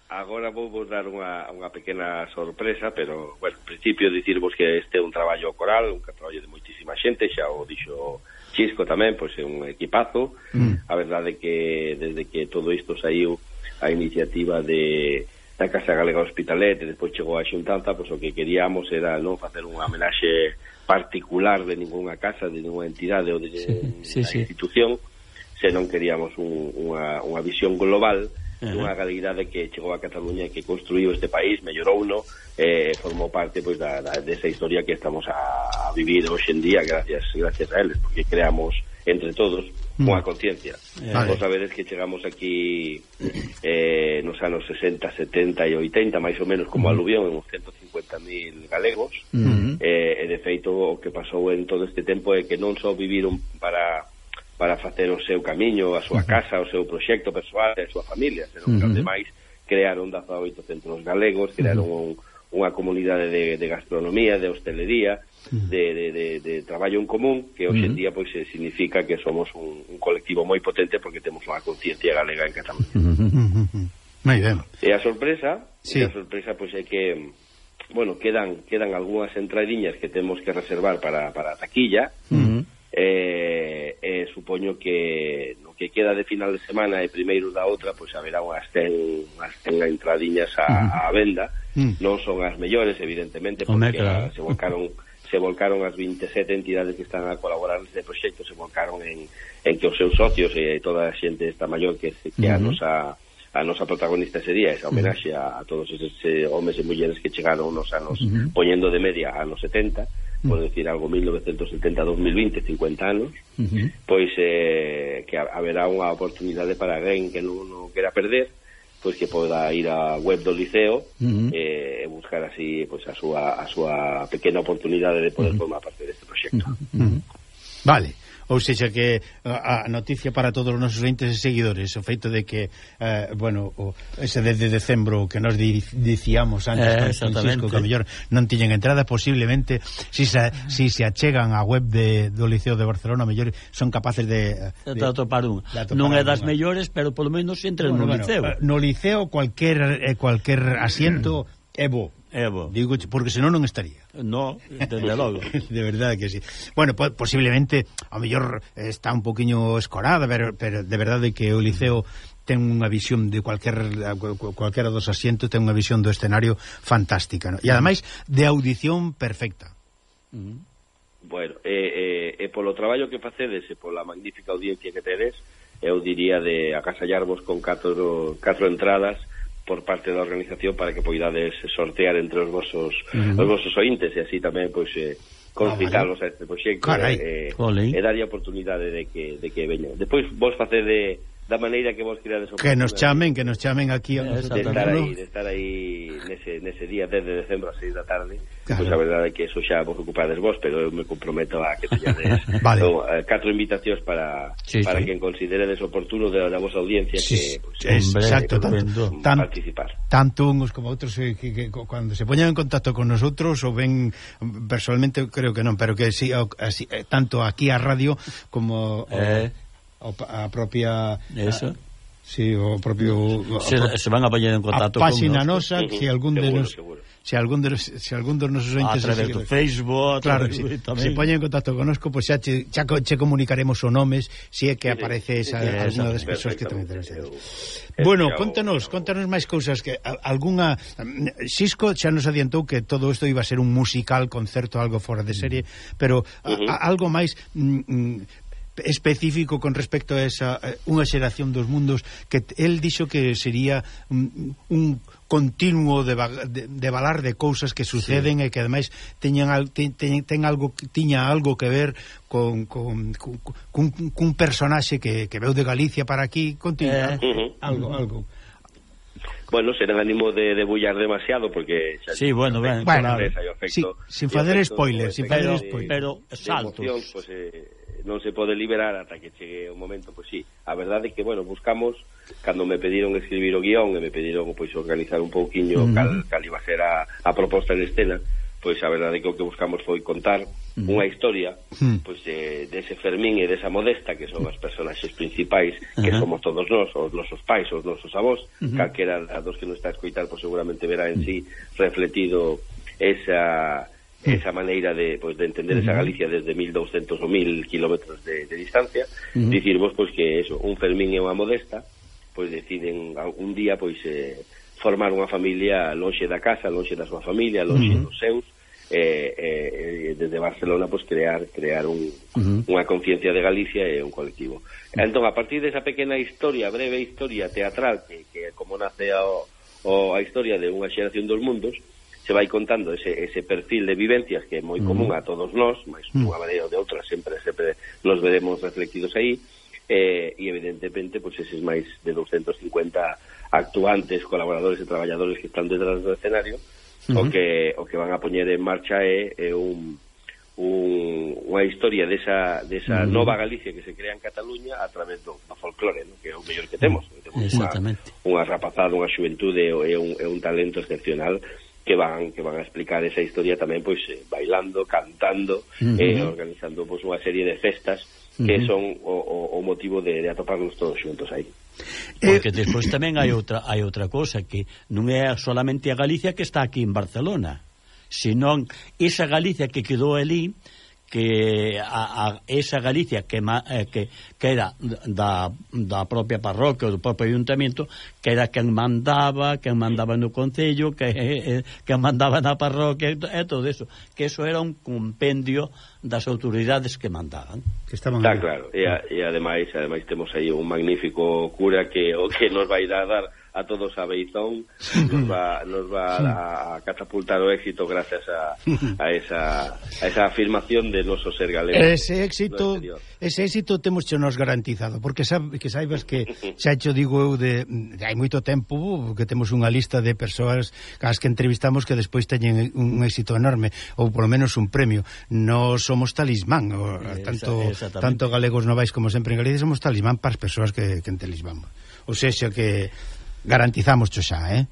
Agora vou vos dar unha, unha pequena sorpresa, pero, bueno, en principio dicirvos que este é un traballo coral, un traballo de moitísima xente, xa o dixo Xisco tamén, pois é un equipazo. Mm. A verdade que desde que todo isto saiu a iniciativa de da Casa Galega Hospitalet e despois chegou a xuntanza, pois o que queríamos era non facer unha homenaxe particular de ninguna casa, de ninguna entidade ou de sí, sí, sí. institución, senón queríamos un, unha, unha visión global dunha galeguidade que chegou a Cataluña e que construiu este país, mellorou uno, eh, formou parte pois da, da, desa historia que estamos a, a vivir hoxe en día gracias gracias a eles, porque creamos entre todos unha conciencia. Vale. Vos sabedes que chegamos aquí eh, nos anos sesenta, setenta e oitenta, máis ou menos como aluvión, en uns ciento cincuenta mil galegos, uh-huh. eh, e de feito o que pasou en todo este tempo é que non só viviron para para facer o seu camiño, a súa casa, o seu proxecto persoal e a súa familia, senón que, uh-huh. ademais, crearon dezaoito centros galegos, crearon uh-huh. un, unha comunidade de, de gastronomía, de hostelería, uh-huh. de, de, de, de traballo en común, que hoxe en día pois pues, significa que somos un, un colectivo moi potente porque temos unha conciencia galega en Cataluña. Uh-huh. Moi ben. E a sorpresa, sí. e a sorpresa pois pues, é que, bueno, quedan quedan algunhas entradiñas que temos que reservar para, para a taquilla, uh-huh. eh, eh, supoño que no que queda de final de semana e primeiro da outra, pois haberá unhas ten, unhas ten entradiñas a, uh-huh. a venda, uh-huh. non son as mellores, evidentemente, porque claro. se volcaron se volcaron as veintisiete entidades que están a colaborar neste proxecto, se volcaron en, en que os seus socios e toda a xente esta maior que, que uh-huh. a nosa a nosa protagonista sería esa homenaxe a, a todos esos eh, homes e mulleres que chegaron nos anos, uh-huh. poñendo de media anos setenta, por decir algo, mil novecientos setenta a dos mil vinte, cincuenta anos, uh-huh. pois eh, que haberá unha oportunidade para alguén que non, non quera perder, pois que poda ir á web do Liceo uh-huh. e eh, buscar así pois a súa a súa pequena oportunidade de poder uh-huh. formar parte deste proxecto. Uh-huh. Vale. Ou seja que a noticia para todos os nosos entes e seguidores, o feito de que eh, bueno, o, ese de, de decembro que nos di, dicíamos antes eh, Francisco, que a mellor non tiñen entrada, posiblemente si se, si se achegan á web de, do Liceo de Barcelona, a mellor son capaces de, de, de atopar un. Non é das mellores, pero polo menos entren bueno, no bueno, Liceo. No Liceo cualquier, eh, cualquier asiento é bo. Evo. Digo, porque senón non estaría. No, desde logo. De verdade que sí. Bueno, po posiblemente a mellor está un poquinho escorada, pero, pero de verdade que o Liceo ten unha visión de cualquier cualquera dos asientos, ten unha visión do escenario fantástica, ¿no? E ademais de audición perfecta. Uh-huh. Bueno, e eh, eh, polo traballo que facedes e pola magnífica audiencia que tedes, eu diría de agasallarvos con catro, catro entradas por parte da organización para que poidades sortear entre os vosos uh-huh. os vosos ointes e así tamén pois eh, concitalos ah, vale. a este proxecto e, eh, e darlle a oportunidade de que de que veñan. Despois vos facede da maneira que vos querades que nos chamen, que nos chamen aquí a de estar aí, de estar aí nese, nese día dez de decembro a seis da tarde, claro. Pois a verdade é que eso xa vos ocupades vos, pero eu me comprometo a que teñades vale. so, uh, catro invitacións para sí, para sí. que consideredes oportuno da, da vosa audiencia sí, que pues, es, hombre, exacto, tanto, tan, participar. Tanto uns como outros eh, que, que, que cuando se poñan en contacto con nosotros ou ven personalmente creo que non, pero que sí, así, eh, tanto aquí a radio como eh. o, a propia eso a, sí, o propio se, a, se van a poñer en contacto con página nosa, uh -huh. si algún de seguro, nos seguro. si algún de si algún dos nosos entes a través do Facebook, claro, si, se poñen en contacto conosco, pois pues xa che, xa che comunicaremos o nomes si é que sí, aparece esa, sí, alguna das persoas que tamén interesan. Bueno, contanos, contanos máis cousas que algunha Xisco xa nos adiantou que todo isto iba a ser un musical, concerto, algo fora de serie, pero uh -huh. a, a, algo máis mm, específico con respecto a esa unha xeración dos mundos que el dixo que sería un, un continuo de, de, de valar de cousas que suceden sí. e que ademais teñan ten, ten algo tiña algo que ver con con, con, con, con un personaxe que, que veu de Galicia para aquí, continúa eh. uh -huh. algo algo Bueno, será ánimo de, de bullar demasiado porque xa sí, bueno, ben, bueno, claro. sí, sin facer spoilers, sin facer spoilers, pero saltos. Emoción, pues, eh, non se pode liberar ata que chegue o momento, pois pues, sí. A verdade é que, bueno, buscamos, cando me pediron escribir o guión e me pediron, pois, pues, organizar un pouquiño uh -huh. cal, cal iba a ser a, a proposta en escena, pois pues, a verdade é que o que buscamos foi contar uh -huh. unha historia, uh -huh. pois, pues, de, de ese Fermín e desa Modesta, que son os personaxes principais, uh -huh. que somos todos nós, os nosos pais, os nosos avós, uh -huh. calquera a dos que non está a escoitar, pois, pues, seguramente verá en sí refletido esa... esa maneira de, pues, de entender uh -huh. esa Galicia desde mil doscientos ou mil kilómetros de, de distancia, uh -huh. dicirvos pois pues, que eso, un Fermín e unha Modesta pois pues, deciden un día pois pues, eh, formar unha familia lonxe da casa, lonxe da súa familia, lonxe uh -huh. dos seus, eh, eh, desde Barcelona pues crear crear un, uh-huh. unha conciencia de Galicia e un colectivo. Uh-huh. Entón, a partir desa pequena historia, breve historia teatral, que, que como nace a, o, a historia de unha xeración dos mundos, se vai contando ese, ese perfil de vivencias que é moi uh-huh. común a todos nós, mas de unha maneira ou de outra sempre sempre nos veremos reflectidos aí, eh, e evidentemente pues, eses máis de doscientos cincuenta actuantes, colaboradores e traballadores que están detrás do escenario, Uh-huh. o que o que van a poñer en marcha é, é un, un unha historia desa, desa uh-huh. nova Galicia que se crea en Cataluña a través do, do folclore, ¿no? Que é o mellor que temos, que temos unha, unha rapazada, unha xuventude e un, é un talento excepcional que van que van a explicar esa historia tamén pois eh, bailando, cantando uh-huh. e organizando pois unha serie de festas que uh-huh. son o, o, o motivo de, de atoparnos todos xuntos aí. Porque despois tamén hai outra hai outra cousa, que non é solamente a Galicia que está aquí en Barcelona, senón esa Galicia que quedou ali, que a, a esa Galicia que, que, que era da, da propia parroquia ou do propio ayuntamiento, que era quen mandaba, quen mandaba no concello, que, que mandaba na parroquia e todo eso, que eso era un compendio das autoridades que mandaban, que estaban Está claro, e, a, e ademais, ademais temos aí un magnífico cura que o que nos vai dar a todos a beizón, nos va, nos va a, a catapultar o éxito gracias a, a esa a esa afirmación de noso ser galego. Ese éxito, ese éxito temos che nos garantizado, porque sabe, que saibas que xa cho digo eu de, de hai moito tempo que temos unha lista de persoas as que entrevistamos que despois teñen un éxito enorme, ou polo menos un premio. Nos somos talismán, o, tanto tanto galegos novais como sempre en Galicia somos talismán para as persoas que, que en talismán. O sexa que garantizamos xo xa, eh?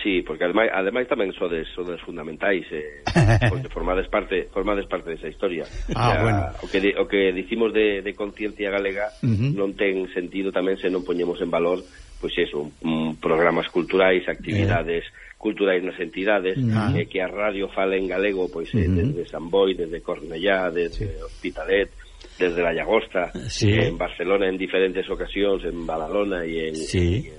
Sí, porque ademais, ademais tamén sodes, sodes fundamentais, eh, porque formades parte formades parte desa historia. Ah, ya, bueno. O que, o que dicimos de, de conciencia galega uh-huh. non ten sentido tamén se non poñemos en valor pois pues eso, un, un programas culturais, actividades eh. culturais nas entidades, uh-huh. eh, que a radio fala en galego, pois pues, uh-huh. eh, desde San Boi, desde Cornellá, desde sí. Hospitalet, desde La Llagosta, sí. eh, en Barcelona en diferentes ocasións, en Badalona e en, sí. en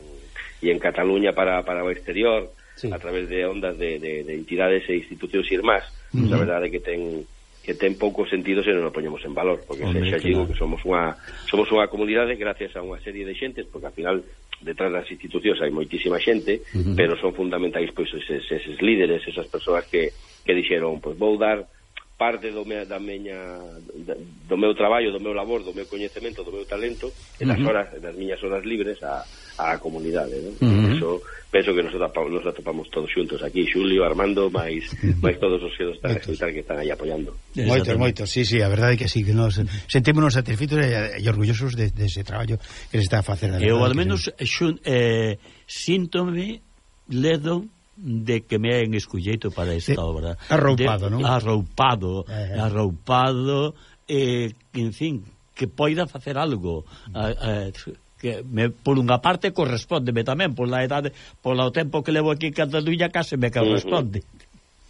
e en Cataluña para, para o exterior, sí. a través de ondas de, de, de entidades e institucións irmás. Uh-huh. Pues a verdade é que ten que ten pouco sentido se non o poñemos en valor, porque Hombre, xa digo que somos unha somos unha comunidade gracias a unha serie de xentes, porque ao final detrás das institucións hai moitísima xente, uh-huh. pero son fundamentais pois eses, eses líderes, esas persoas que, que dixeron, pois vou dar parte do me, da meña do meu traballo, do meu labor, do meu coñecemento, do meu talento, e das horas, das miñas horas libres a, a comunidade, ¿no? Uh-huh. Eso penso que nos atopamos, nos atopamos todos xuntos aquí, Xulio, Armando, máis máis todos os que están a escutar que están aí apoiando. Moitos, moitos, sí, sí, a verdade é que sí, que nos sentímonos satisfeitos e, e orgullosos de, de ese traballo que se está a facer. Eu, al menos, xun, eh, síntome ledo de que me hayan escolleito para esta sí, obra. Arroupado, de, non? Arroupado, eh, arroupado, eh, en fin, que poida facer algo. Eh, eh, que me, por unha parte correspóndeme tamén, por la edade, por o tempo que levo aquí en Cataluña, case me corresponde.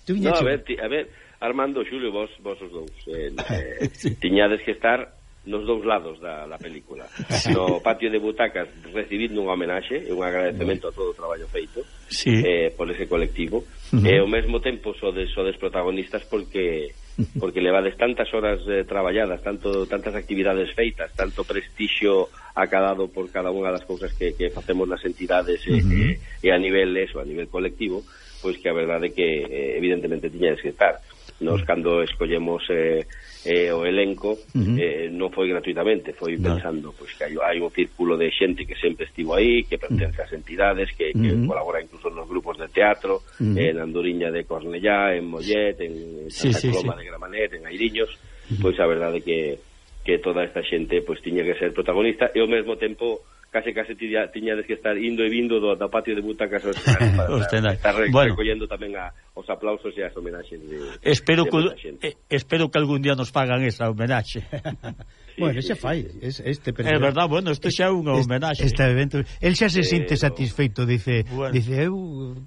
Uh-huh. No, a ver, ti, a ver, Armando, Xulio, vos, vos os dous, eh, eh, sí. tiñades que estar nos dous lados da, da película. No patio de butacas recibindo un homenaxe e un agradecemento a todo o traballo feito sí. eh, por ese colectivo. Uh-huh. E ao mesmo tempo sodes, sodes protagonistas porque porque levades tantas horas eh, traballadas, tanto tantas actividades feitas, tanto prestixio acadado por cada unha das cousas que, que facemos nas entidades uh-huh. e, e a nivel eso, a nivel colectivo, pois que a verdade é que eh, evidentemente tiñades que estar. Nos cando escollemos eh, eh, o elenco uh-huh. eh, non foi gratuitamente, foi no. pensando pois que hai, hai un círculo de xente que sempre estivo aí, que pertence ás entidades, que, que uh-huh. colabora incluso nos grupos de teatro, uh-huh. en Andoriña de Cornellá, en Mollet, en Santa sí, Coloma sí, sí. de Gramanet, en Airiños, uh-huh. pois a verdade que que toda esta xente pois tiña que ser protagonista e ao mesmo tempo case case tiña, tiñades que estar indo e vindo do, do patio de butacas para estar, estar re, bueno. recollendo tamén a, os aplausos e as homenaxes de, espero, de que, eh, espero que algún día nos pagan esa homenaxe. Sí, bueno, xa sí, fai sí. este é verdad, bueno, isto xa é unha homenaxe este, este evento, el xa se sinte eh, satisfeito, dice, bueno. dice eu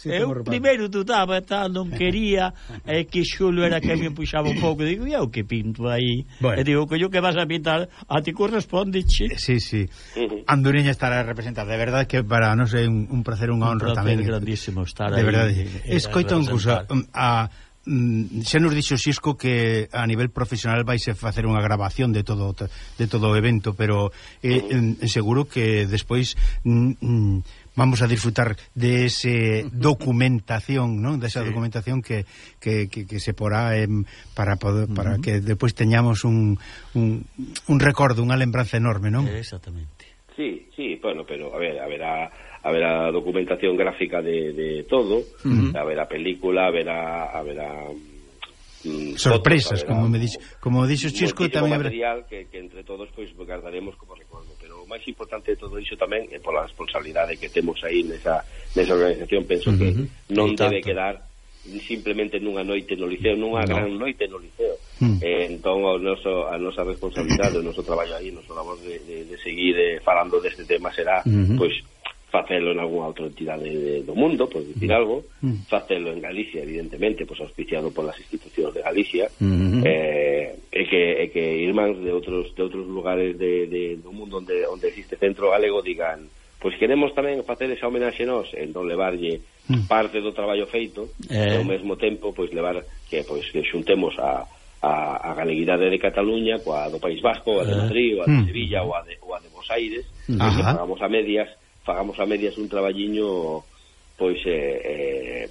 eu primeiro dudaba tal, non quería é que Xulio era que me puxaba un pouco, digo, eu que pinto aí bueno. e digo, que yo que vas a pintar a ti corresponde, che. Sí, sí, uh-huh. Andoriña estará representada, de verdade que para non sei un, un placer, unha honra tamén, grandísimo estar de aí, verdade, escoita un cousa a xa nos dixo Xisco que a nivel profesional vais a facer unha grabación de todo de todo o evento, pero eh, en, en seguro que despois mm, vamos a disfrutar de ese documentación, ¿no? De esa sí. documentación que, que, que, que se porá eh, para poder, para uh -huh. que despois teñamos un, un, un recordo, unha lembranza enorme, ¿no? Exactamente. Sí, sí, bueno, pero a ver, haberá haberá documentación gráfica de, de todo, uh-huh. haberá película, haberá haberá mm, sorpresas, fotos, haberá, como me dixo, como dixo Xisco, tamén habrá material que, que entre todos pois pues, guardaremos como recordo, pero o máis importante de todo iso tamén é pola responsabilidade que temos aí nesa nesa organización, penso uh-huh. que non debe quedar simplemente nunha noite no liceo, nunha no. gran noite no liceo. Mm. Eh, entón o noso, a nosa responsabilidade, o noso traballo aí, o noso labor de, de, de seguir eh, falando deste tema será, mm-hmm. pois, facelo en algunha outra entidade de, do mundo, por dicir mm. algo, mm. facelo en Galicia, evidentemente, pois auspiciado polas institucións de Galicia, mm-hmm. eh, e que e que irmáns de outros de outros lugares de, de, do mundo onde onde existe centro galego digan, pois queremos tamén facer esa homenaxe nós, entón levarlle mm. parte do traballo feito, eh. e ao mesmo tempo pois levar que pois que xuntemos a a, a galeguidade de Cataluña coa do País Vasco, a de Madrid, ou a de Sevilla, ou a de, ou a de Buenos Aires, que fagamos a medias, fagamos a medias un traballiño pois eh, eh,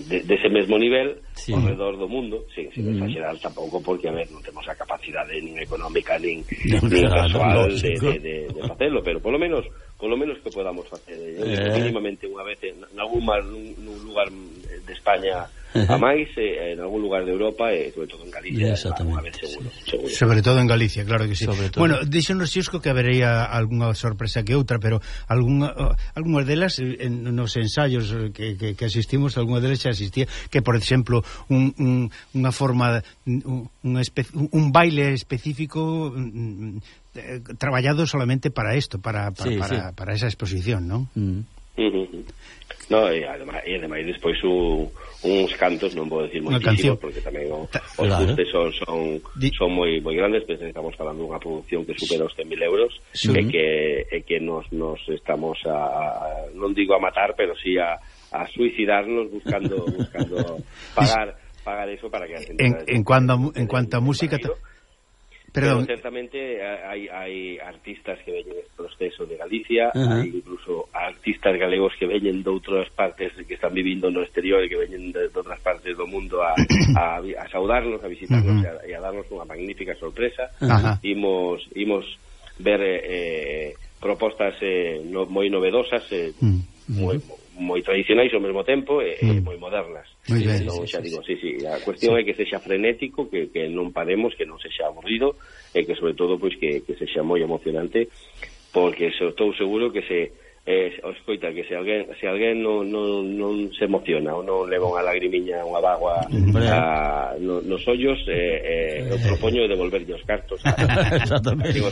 de, de ese mesmo nivel sí. ao redor do mundo, sin, sin mm. exagerar tampouco, porque a ver, non temos a capacidade nin económica nin, no, nin claro, casual de, de, de, de facelo, pero polo menos polo menos que podamos facer eh, mínimamente unha vez en, en algún mar, nun, nun lugar de España a máis, eh, en algún lugar de Europa e sobre todo en Galicia, unha vez seguro, seguro. Sobre todo en Galicia, claro que sí. Bueno, dixonos Xisco que habería algunha sorpresa que outra, pero algunha, algunhas delas en, nos ensaios que, que, que asistimos, algunha delas xa asistía, que por exemplo un, un, unha forma un, una espe- un baile específico mm, eh, traballado solamente para isto, para, para, sí, para, sí. para esa exposición, ¿no? Mm. Uh-huh. No, e ademais, e ademais despois u, uns cantos, non vou decir moitísimos, porque tamén o, os claro. custes son son, son moi moi grandes, pero estamos falando dunha produción que supera os cen mil euros, sí. e que e que nos nos estamos a, a non digo a matar, pero sí a, a suicidarnos buscando buscando pagar pagar eso para que en, en cuanto en cuanto a música ta... Pero certamente hai, hai artistas que veñen este proceso de Galicia, uh-huh. hai incluso artistas galegos que veñen de outras partes que están vivindo no exterior e que veñen de, de outras partes do mundo a, a, a saudarnos, a visitarnos uh-huh. e, a, e a darnos unha magnífica sorpresa. Uh-huh. Imos, imos ver eh, propostas eh, no, moi novedosas, eh, uh-huh. moi, moi tradicionais ao mesmo tempo e uh-huh. moi modernas. Muy ben, entón, sí, xa sí, digo, sí, sí, a cuestión sí. é que sexa frenético, que, que non paremos, que non sexa aburrido e que sobre todo pois que, que sexa moi emocionante, porque estou seguro que se eh, escoita que se alguén se alguén non, non, non se emociona ou non leva unha lagrimiña, unha bagua a, no, nos ollos, eh, eh, eu propoño devolverlle os cartos a, exactamente. A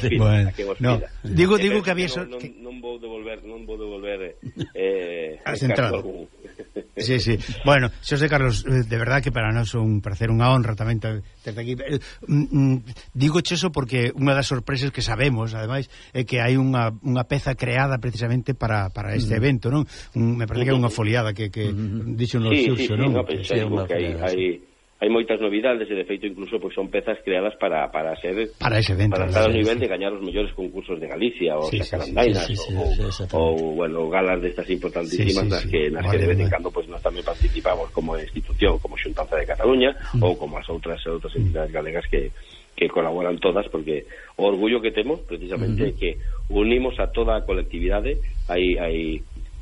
que bueno, pida, no, digo, digo que había non, non, non vou devolver non vou devolver eh, has entrado algún. Sí, sí. Bueno, Xosé Carlos, de verdad que para nós é un placer, unha honra tamén desde aquí. Eh, mm, digo eso porque unha das sorpresas que sabemos, ademais, é que hai unha, unha peza creada precisamente para, para este evento, non? Un, me parece que é unha foliada que, que uh-huh. dixo no sí, Xurxo, sí, non? Sí, no, que, sí, que hai, hai, hai moitas novidades e de feito incluso pois son pezas creadas para para ser para ese evento, para estar ao nivel sí. de gañar os mellores concursos de Galicia ou sí, Sacarandainas sí, sí, sí, ou, sí, sí, ou bueno, galas destas importantísimas sí, sí, nas que nas vale, que de vez en cando pois nós tamén participamos como institución, como Xuntanza de Cataluña mm. ou como as outras outras entidades galegas que que colaboran todas, porque o orgullo que temos precisamente é mm-hmm. que unimos a toda a colectividade. Hai hai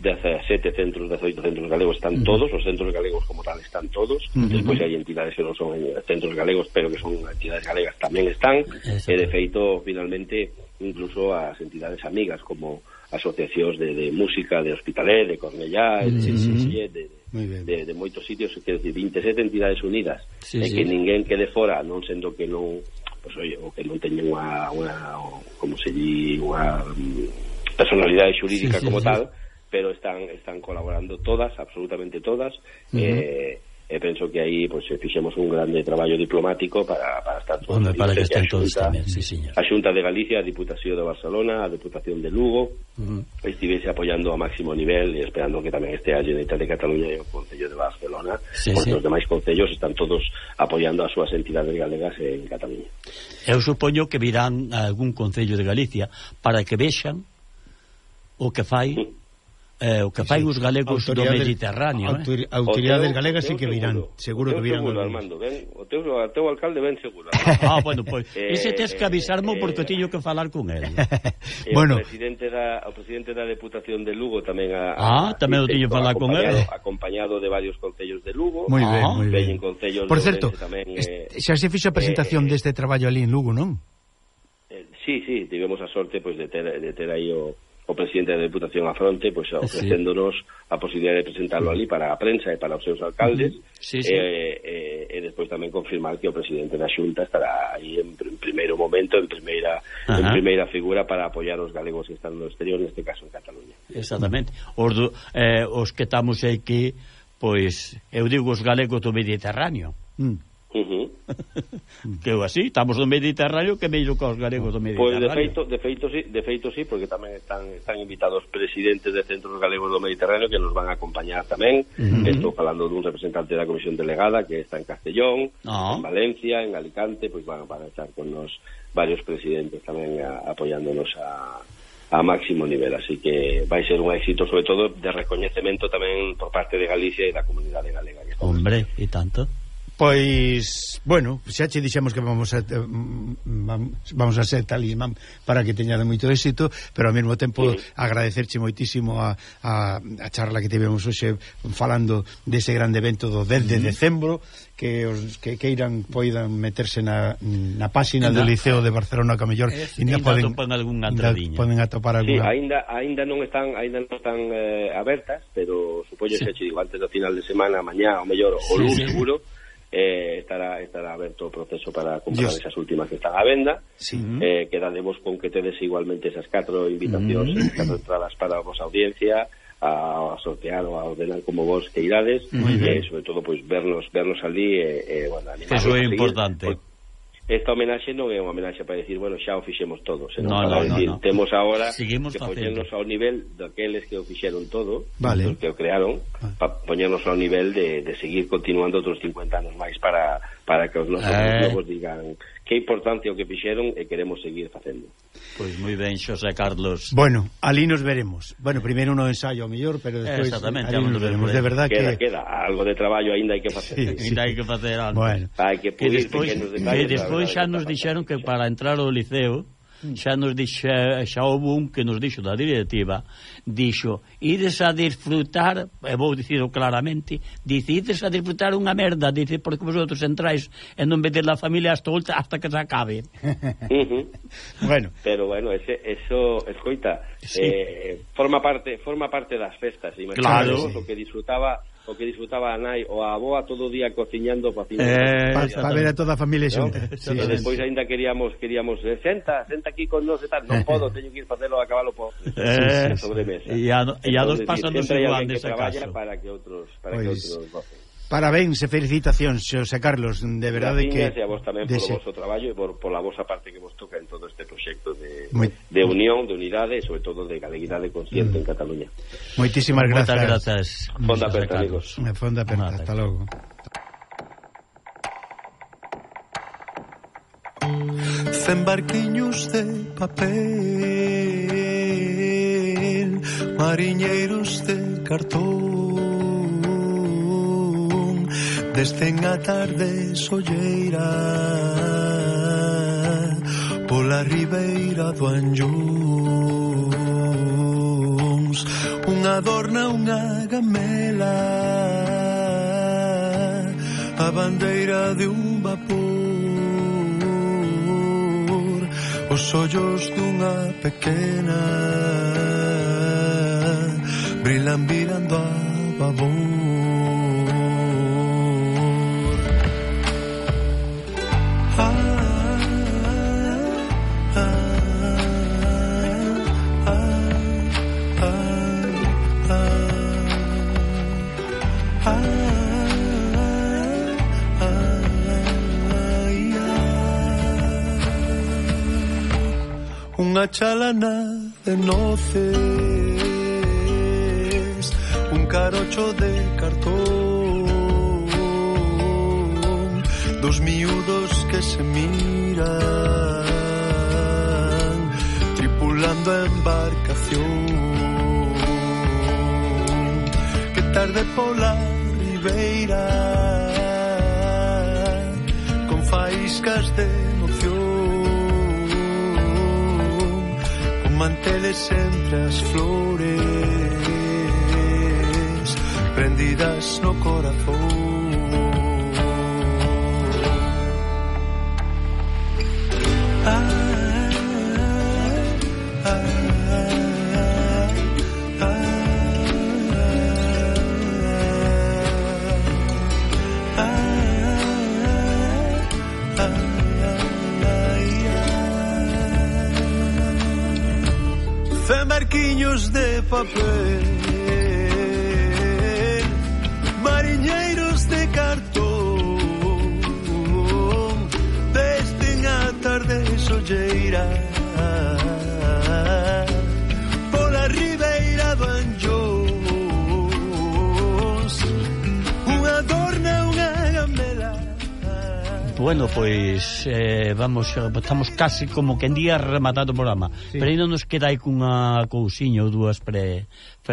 dezasete centros, dezoito centros galegos, están uh-huh. todos, os centros galegos como tal están todos, uh-huh. despois hai entidades que non son centros galegos, pero que son entidades galegas tamén están, e de feito, finalmente, incluso as entidades amigas, como asociacións de, de música de Hospitalet, de Cornellá, uh-huh. de Sitges, de, de, de, de moitos sitios, que decir, veintisiete entidades unidas, sí, e sí. que ninguén quede fora, non sendo que non, pues, oye, o que non teñen unha, unha como se di, unha personalidade xurídica sí, sí, como sí. tal, pero están están colaborando todas, absolutamente todas, uh-huh. eh, e penso que aí pues, fixemos un grande traballo diplomático para, para estar todos. Hombre, para que estén todos tamén, sí, señor. A Xunta de Galicia, a Diputación de Barcelona, a Diputación de Lugo, uh-huh. estivese apoiando a máximo nivel e esperando que tamén este a Generalitat de Cataluña e o Concello de Barcelona, sí, porque sí. os demais concellos están todos apoiando as súas entidades galegas en Cataluña. Eu supoño que virán a algún concello de Galicia para que vexan o que fai uh-huh. Eh, o que fai sí, os galegos do Mediterráneo, eh? Autoridades galegas sí que virán, seguro, seguro que virán. Seguro, Armando, ven, o teu, o teu alcalde ven seguro. Ah, bueno, pois, pues, ese tes que avisarmo eh, porque teño que falar con él. Eh, bueno, o presidente da o presidente da Deputación de Lugo tamén a, Ah, tamén o teño que falar con él. Acompañado de varios concellos de Lugo. Moi ben, moi ben. Por certo, tamén, eh, xa se fixo a presentación eh, deste traballo ali en Lugo, non? Eh, sí, sí, tivemos a sorte pois pues, de ter de ter aí o o presidente da Deputación a fronte, pois pues, ofrecéndonos sí. a posibilidade de presentarlo ali para a prensa e para os seus alcaldes, sí, sí. E, e, e despois tamén confirmar que o presidente da Xunta estará aí en, en primeiro momento, en primeira Ajá. en primeira figura para apoiar os galegos que están no exterior, neste caso en Cataluña. Exactamente. Os, do, eh, os que estamos aquí, pois, eu digo os galegos do Mediterráneo. Mm. Uh-huh. Que eu así, estamos no Mediterráneo que meiro que os galegos do Mediterráneo. Pois de feito, de feito sí, de feito sí, porque tamén están están invitados presidentes de centros galegos do Mediterráneo que nos van a acompañar tamén. Uh-huh. Estou falando dun representante da Comisión Delegada que está en Castellón, uh-huh. en Valencia, en Alicante, pois van, van a estar con nos varios presidentes tamén a, apoiándonos a a máximo nivel, así que vai ser un éxito, sobre todo de recoñecemento tamén por parte de Galicia e da comunidade galega. Hombre, e tanto. Pois, bueno, xa che dixemos que vamos a vamos a ser talismán para que teña de moito éxito, pero ao mesmo tempo sí. agradecerche moitísimo a, a, a charla que tivemos hoxe falando dese grande evento do dez de decembro, que os que queiran poidan meterse na, na páxina do Liceo de Barcelona, que a mellor ainda poden atopan algunha entradiña. Poden atopar alguna. Sí, ainda aínda non están aínda non están eh, abertas, pero supoño que sí. digo antes do final de semana, mañá ou mellor o sí, lunes sí. seguro. Eh, estará estará aberto o proceso para comprar Dios. Esas últimas que están á venda. Sí. Eh, quedademos con que tedes igualmente esas catro invitacións, mm-hmm. catro entradas para a vosa audiencia a, a sortear ou a ordenar como vos que irades, e eh, sobre todo pois vernos vernos ali e eh, bueno, eso é importante. Por, esta homenaxe non é unha homenaxe para decir, bueno, xa o fixemos todo, senón no, para no, decir, no, no. temos agora Seguimos que facendo. poñernos ao nivel daqueles que o fixeron todo, vale. que o crearon, vale. para poñernos ao nivel de, de seguir continuando outros cincuenta anos máis para, para que os nosos eh. novos digan que importancia o que fixeron e queremos seguir facendo. Pois moi ben, Xosé Carlos. Bueno, ali nos veremos. Bueno, primeiro no ensayo ao mellor, pero despois ali nos veremos. De verdad queda, que queda algo de traballo aínda hai que facer. Sí, sí. Ainda hai que facer algo. Bueno, hai que pulir despois, pequenos detalles. E despois xa nos dixeron que para entrar ao liceo xa nos dixe, xa houve un que nos dixo da directiva, dixo, ides a disfrutar, e vou dicirlo claramente, dice, ides a disfrutar unha merda, dice, porque vosotros entrais e non vedes a familia hasta, hasta que se acabe. Uh-huh. Bueno, pero bueno, ese, eso, escoita, sí. eh, forma parte forma parte das festas, claro, o que disfrutaba o que disfrutaba a nai ou a aboa todo o día cociñando para eh, pa, pa ver a toda a familia ¿no? xunta. Sí, e despois aínda queríamos queríamos eh, senta, senta aquí con nós e tal, non podo, teño que ir facelo a cabalo por eh, sobre mesa. E a, e a dos pasanos igual nese caso. Para que outros, para pues, que outros gocen. Parabéns e felicitacións, Xosé Carlos, de verdade que e a vos tamén por o vosso traballo e por, por a vosa parte que vos toca en todo este proxecto de, Muy... de unión, de unidade e sobre todo de galeguidade consciente mm. en Cataluña. Moitísimas grazas. Moitas grazas. Fonda aperta, amigos. Fonda aperta, hasta logo. Cen barquiños de papel, mariñeiros de cartón, descen a tarde solleira pola ribeira do Anllóns, unha adorna unha gamela, a bandeira de un vapor, os ollos dunha pequena brilan virando a babor. Unha chalana de noces, un carocho de cartón, dos miúdos que se miran, tripulando a embarcación. Que tarde pola ribeira, con faíscas de emoción, con manteles entre as flores, prendidas no corazón. Marquiños de papel, mariñeiros de cartón, desde a tarde solleira, pola ribeira do Anllóns, unha dorna, unha gamela. Bueno, pois eh, vamos, estamos casi como que en día rematado o programa, sí. Pero ainda nos queda aí cunha cousiña ou dúas para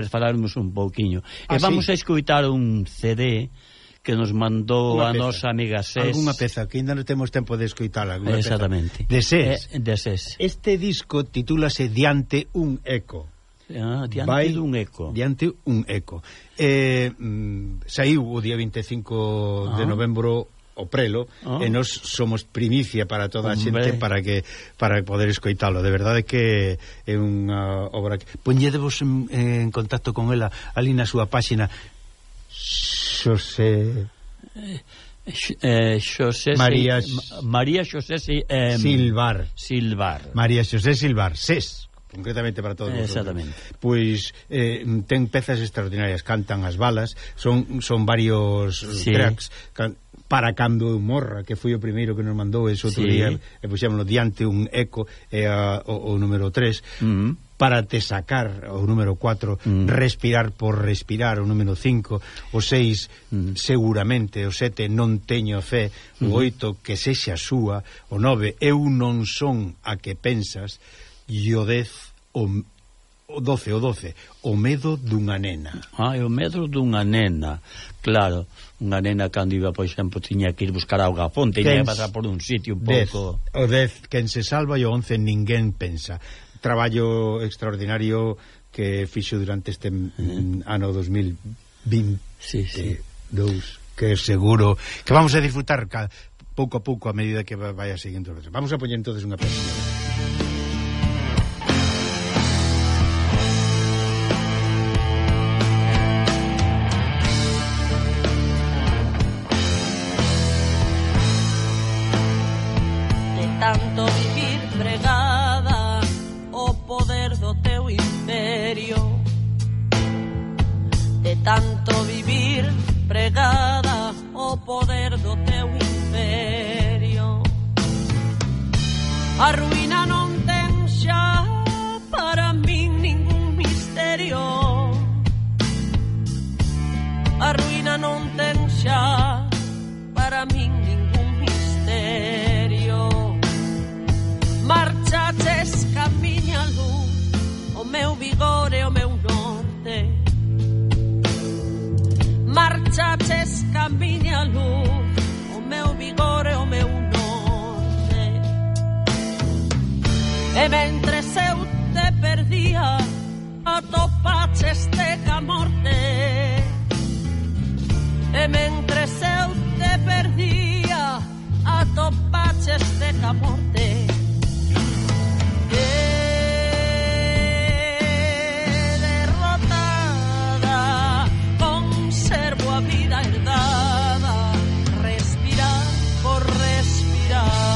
falarmos un pouquiño. Ah, e vamos sí. a escoitar un C D que nos mandou a nosa amiga Ses. Alguna peza que ainda non temos tempo de escoitala. Exactamente. Peza. De Ses. Eh, de Ses. Este disco titúlase Diante un eco. Ah, diante Vai, dun eco. Diante un eco. Eh, mm, saiu o día vinte e cinco ah. de novembro o prelo, oh. e nos somos primicia para toda a xente para que para poder escoitalo. De verdade que é unha obra que poñedevos en, en contacto con ela ali na súa páxina. Xosé eh, Xosé María María Xosé eh, Silvar Silvar María Xosé Silvar Ses, concretamente para todos exactamente. Pois eh, ten pezas extraordinarias, cantan as balas, son son varios sí. tracks can, para cando eu morra, que foi o primeiro que nos mandou ese outro sí. día, e puxémoslo Diante un eco, e a, o, o número tres, uh-huh. Para te sacar, o número cuatro, uh-huh. Respirar por respirar, o número cinco, o seis, uh-huh. Seguramente, o sete, Non teño fe, o oito, Que sexa súa, o nove, Eu non son a que pensas, e o dez, o o doce, o doce, O medo dunha nena. Ah, o medo dunha nena, claro, unha nena cando iba, por exemplo, tiña que ir buscar auga a fonte, e ia pasar por un sitio un pouco... O dez, Quen se salva, e o once, Ninguén pensa. Traballo extraordinario que fixo durante este uh-huh. ano dos mil vinte e dous, sí, sí. Que seguro que vamos a disfrutar ca, pouco a pouco a medida que vaya seguindo. Vamos a poñer entonces unha peça. Tanto vivir pregada o poder do teu imperio, de tanto vivir pregada o poder do teu imperio, a ruína non ten xa para min ningún misterio, a ruína non ten xa para min ningún misterio. Marchaches camiña luz, o meu vigor e o meu norte. Marchaches camiña luz, o meu vigor e o meu norte. E mentres eu te perdía, atopaches te ca morte. E mentres eu te perdía, atopaches te ca morte. Derrotada, conservo a vida herdada, respirar por respirar.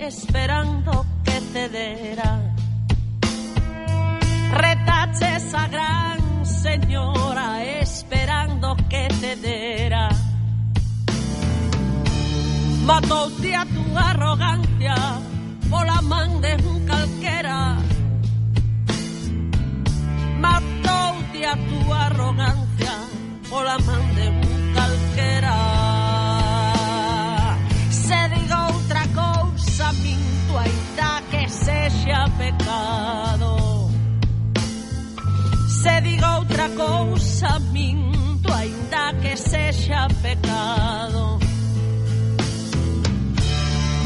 esperando que cedera. Retaches a gran señora esperando que cedera. Matoute a tu arrogancia pola man de un calquera. Matoute a tu arrogancia pola man de un calquera. Se diga outra cousa minto ainda que sexa pecado. Se diga outra cousa minto ainda que sexa pecado.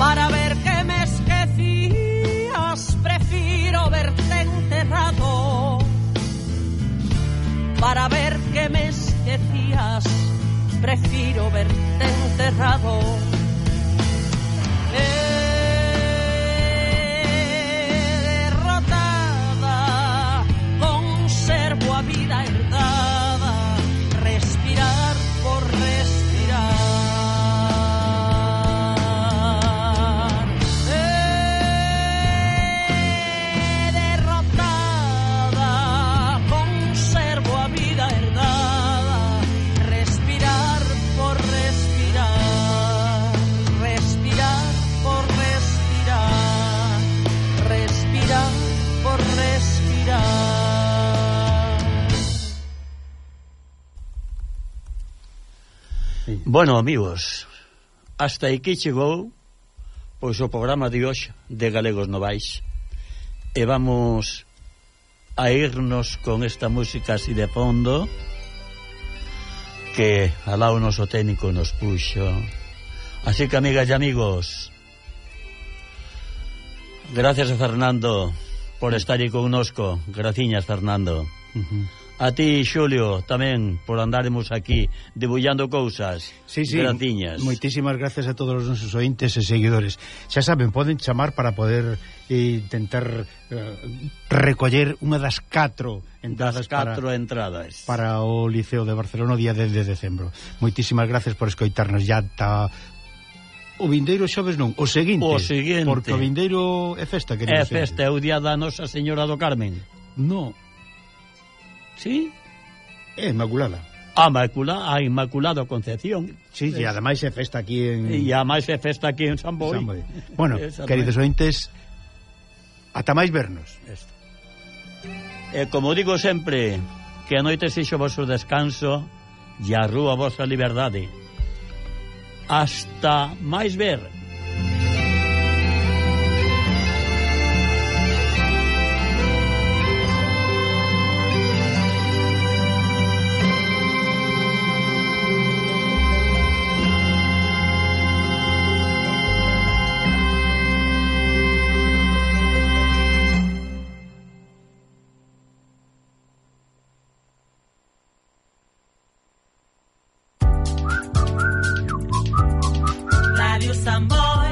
Para ver que me esquecías prefiro verte enterrado. Para ver que me esquecías prefiro verte enterrado. Eh, derrotada conservo a vida herdada, respirar por respirar. Eh, derrotada conservo a vida herdada, respirar por respirar, respirar por respirar, respirar por respirar. Bueno, amigos, hasta aquí chegou pois o programa de hoxe de Galegos Novais, e vamos a irnos con esta música así de fondo que alá o noso técnico nos puxo. Así que, amigas e amigos, gracias a Fernando por estar aí connosco. Graciñas, Fernando. Uh-huh. A ti, Xulio, tamén por andaremos aquí debullando cousas. Sí, sí, graciñas. Moitísimas gracias a todos os nosos ointes e seguidores. Xa saben, poden chamar para poder eh, intentar eh, recoller unha das catro entradas, das catro para, entradas para o Liceo de Barcelona o día dez de decembro. Moitísimas gracias por escoitarnos. Ya está o vindeiro xoves, non, o seguinte, o seguinte, porque o vindeiro é festa, querido. É festa, é o día da Nosa Señora do Carmen. No. Sí? É Inmaculada. A Inmaculada, a Inmaculada Concepción. Sí, e ademais é festa aquí en... E ademais é festa aquí en San Boi. San Boi. Bueno, queridos ointes, ata máis vernos. Esto. E como digo sempre, que a noite sexo vosso descanso e a rúa vosa liberdade. Hasta máis ver. Radio San Boi.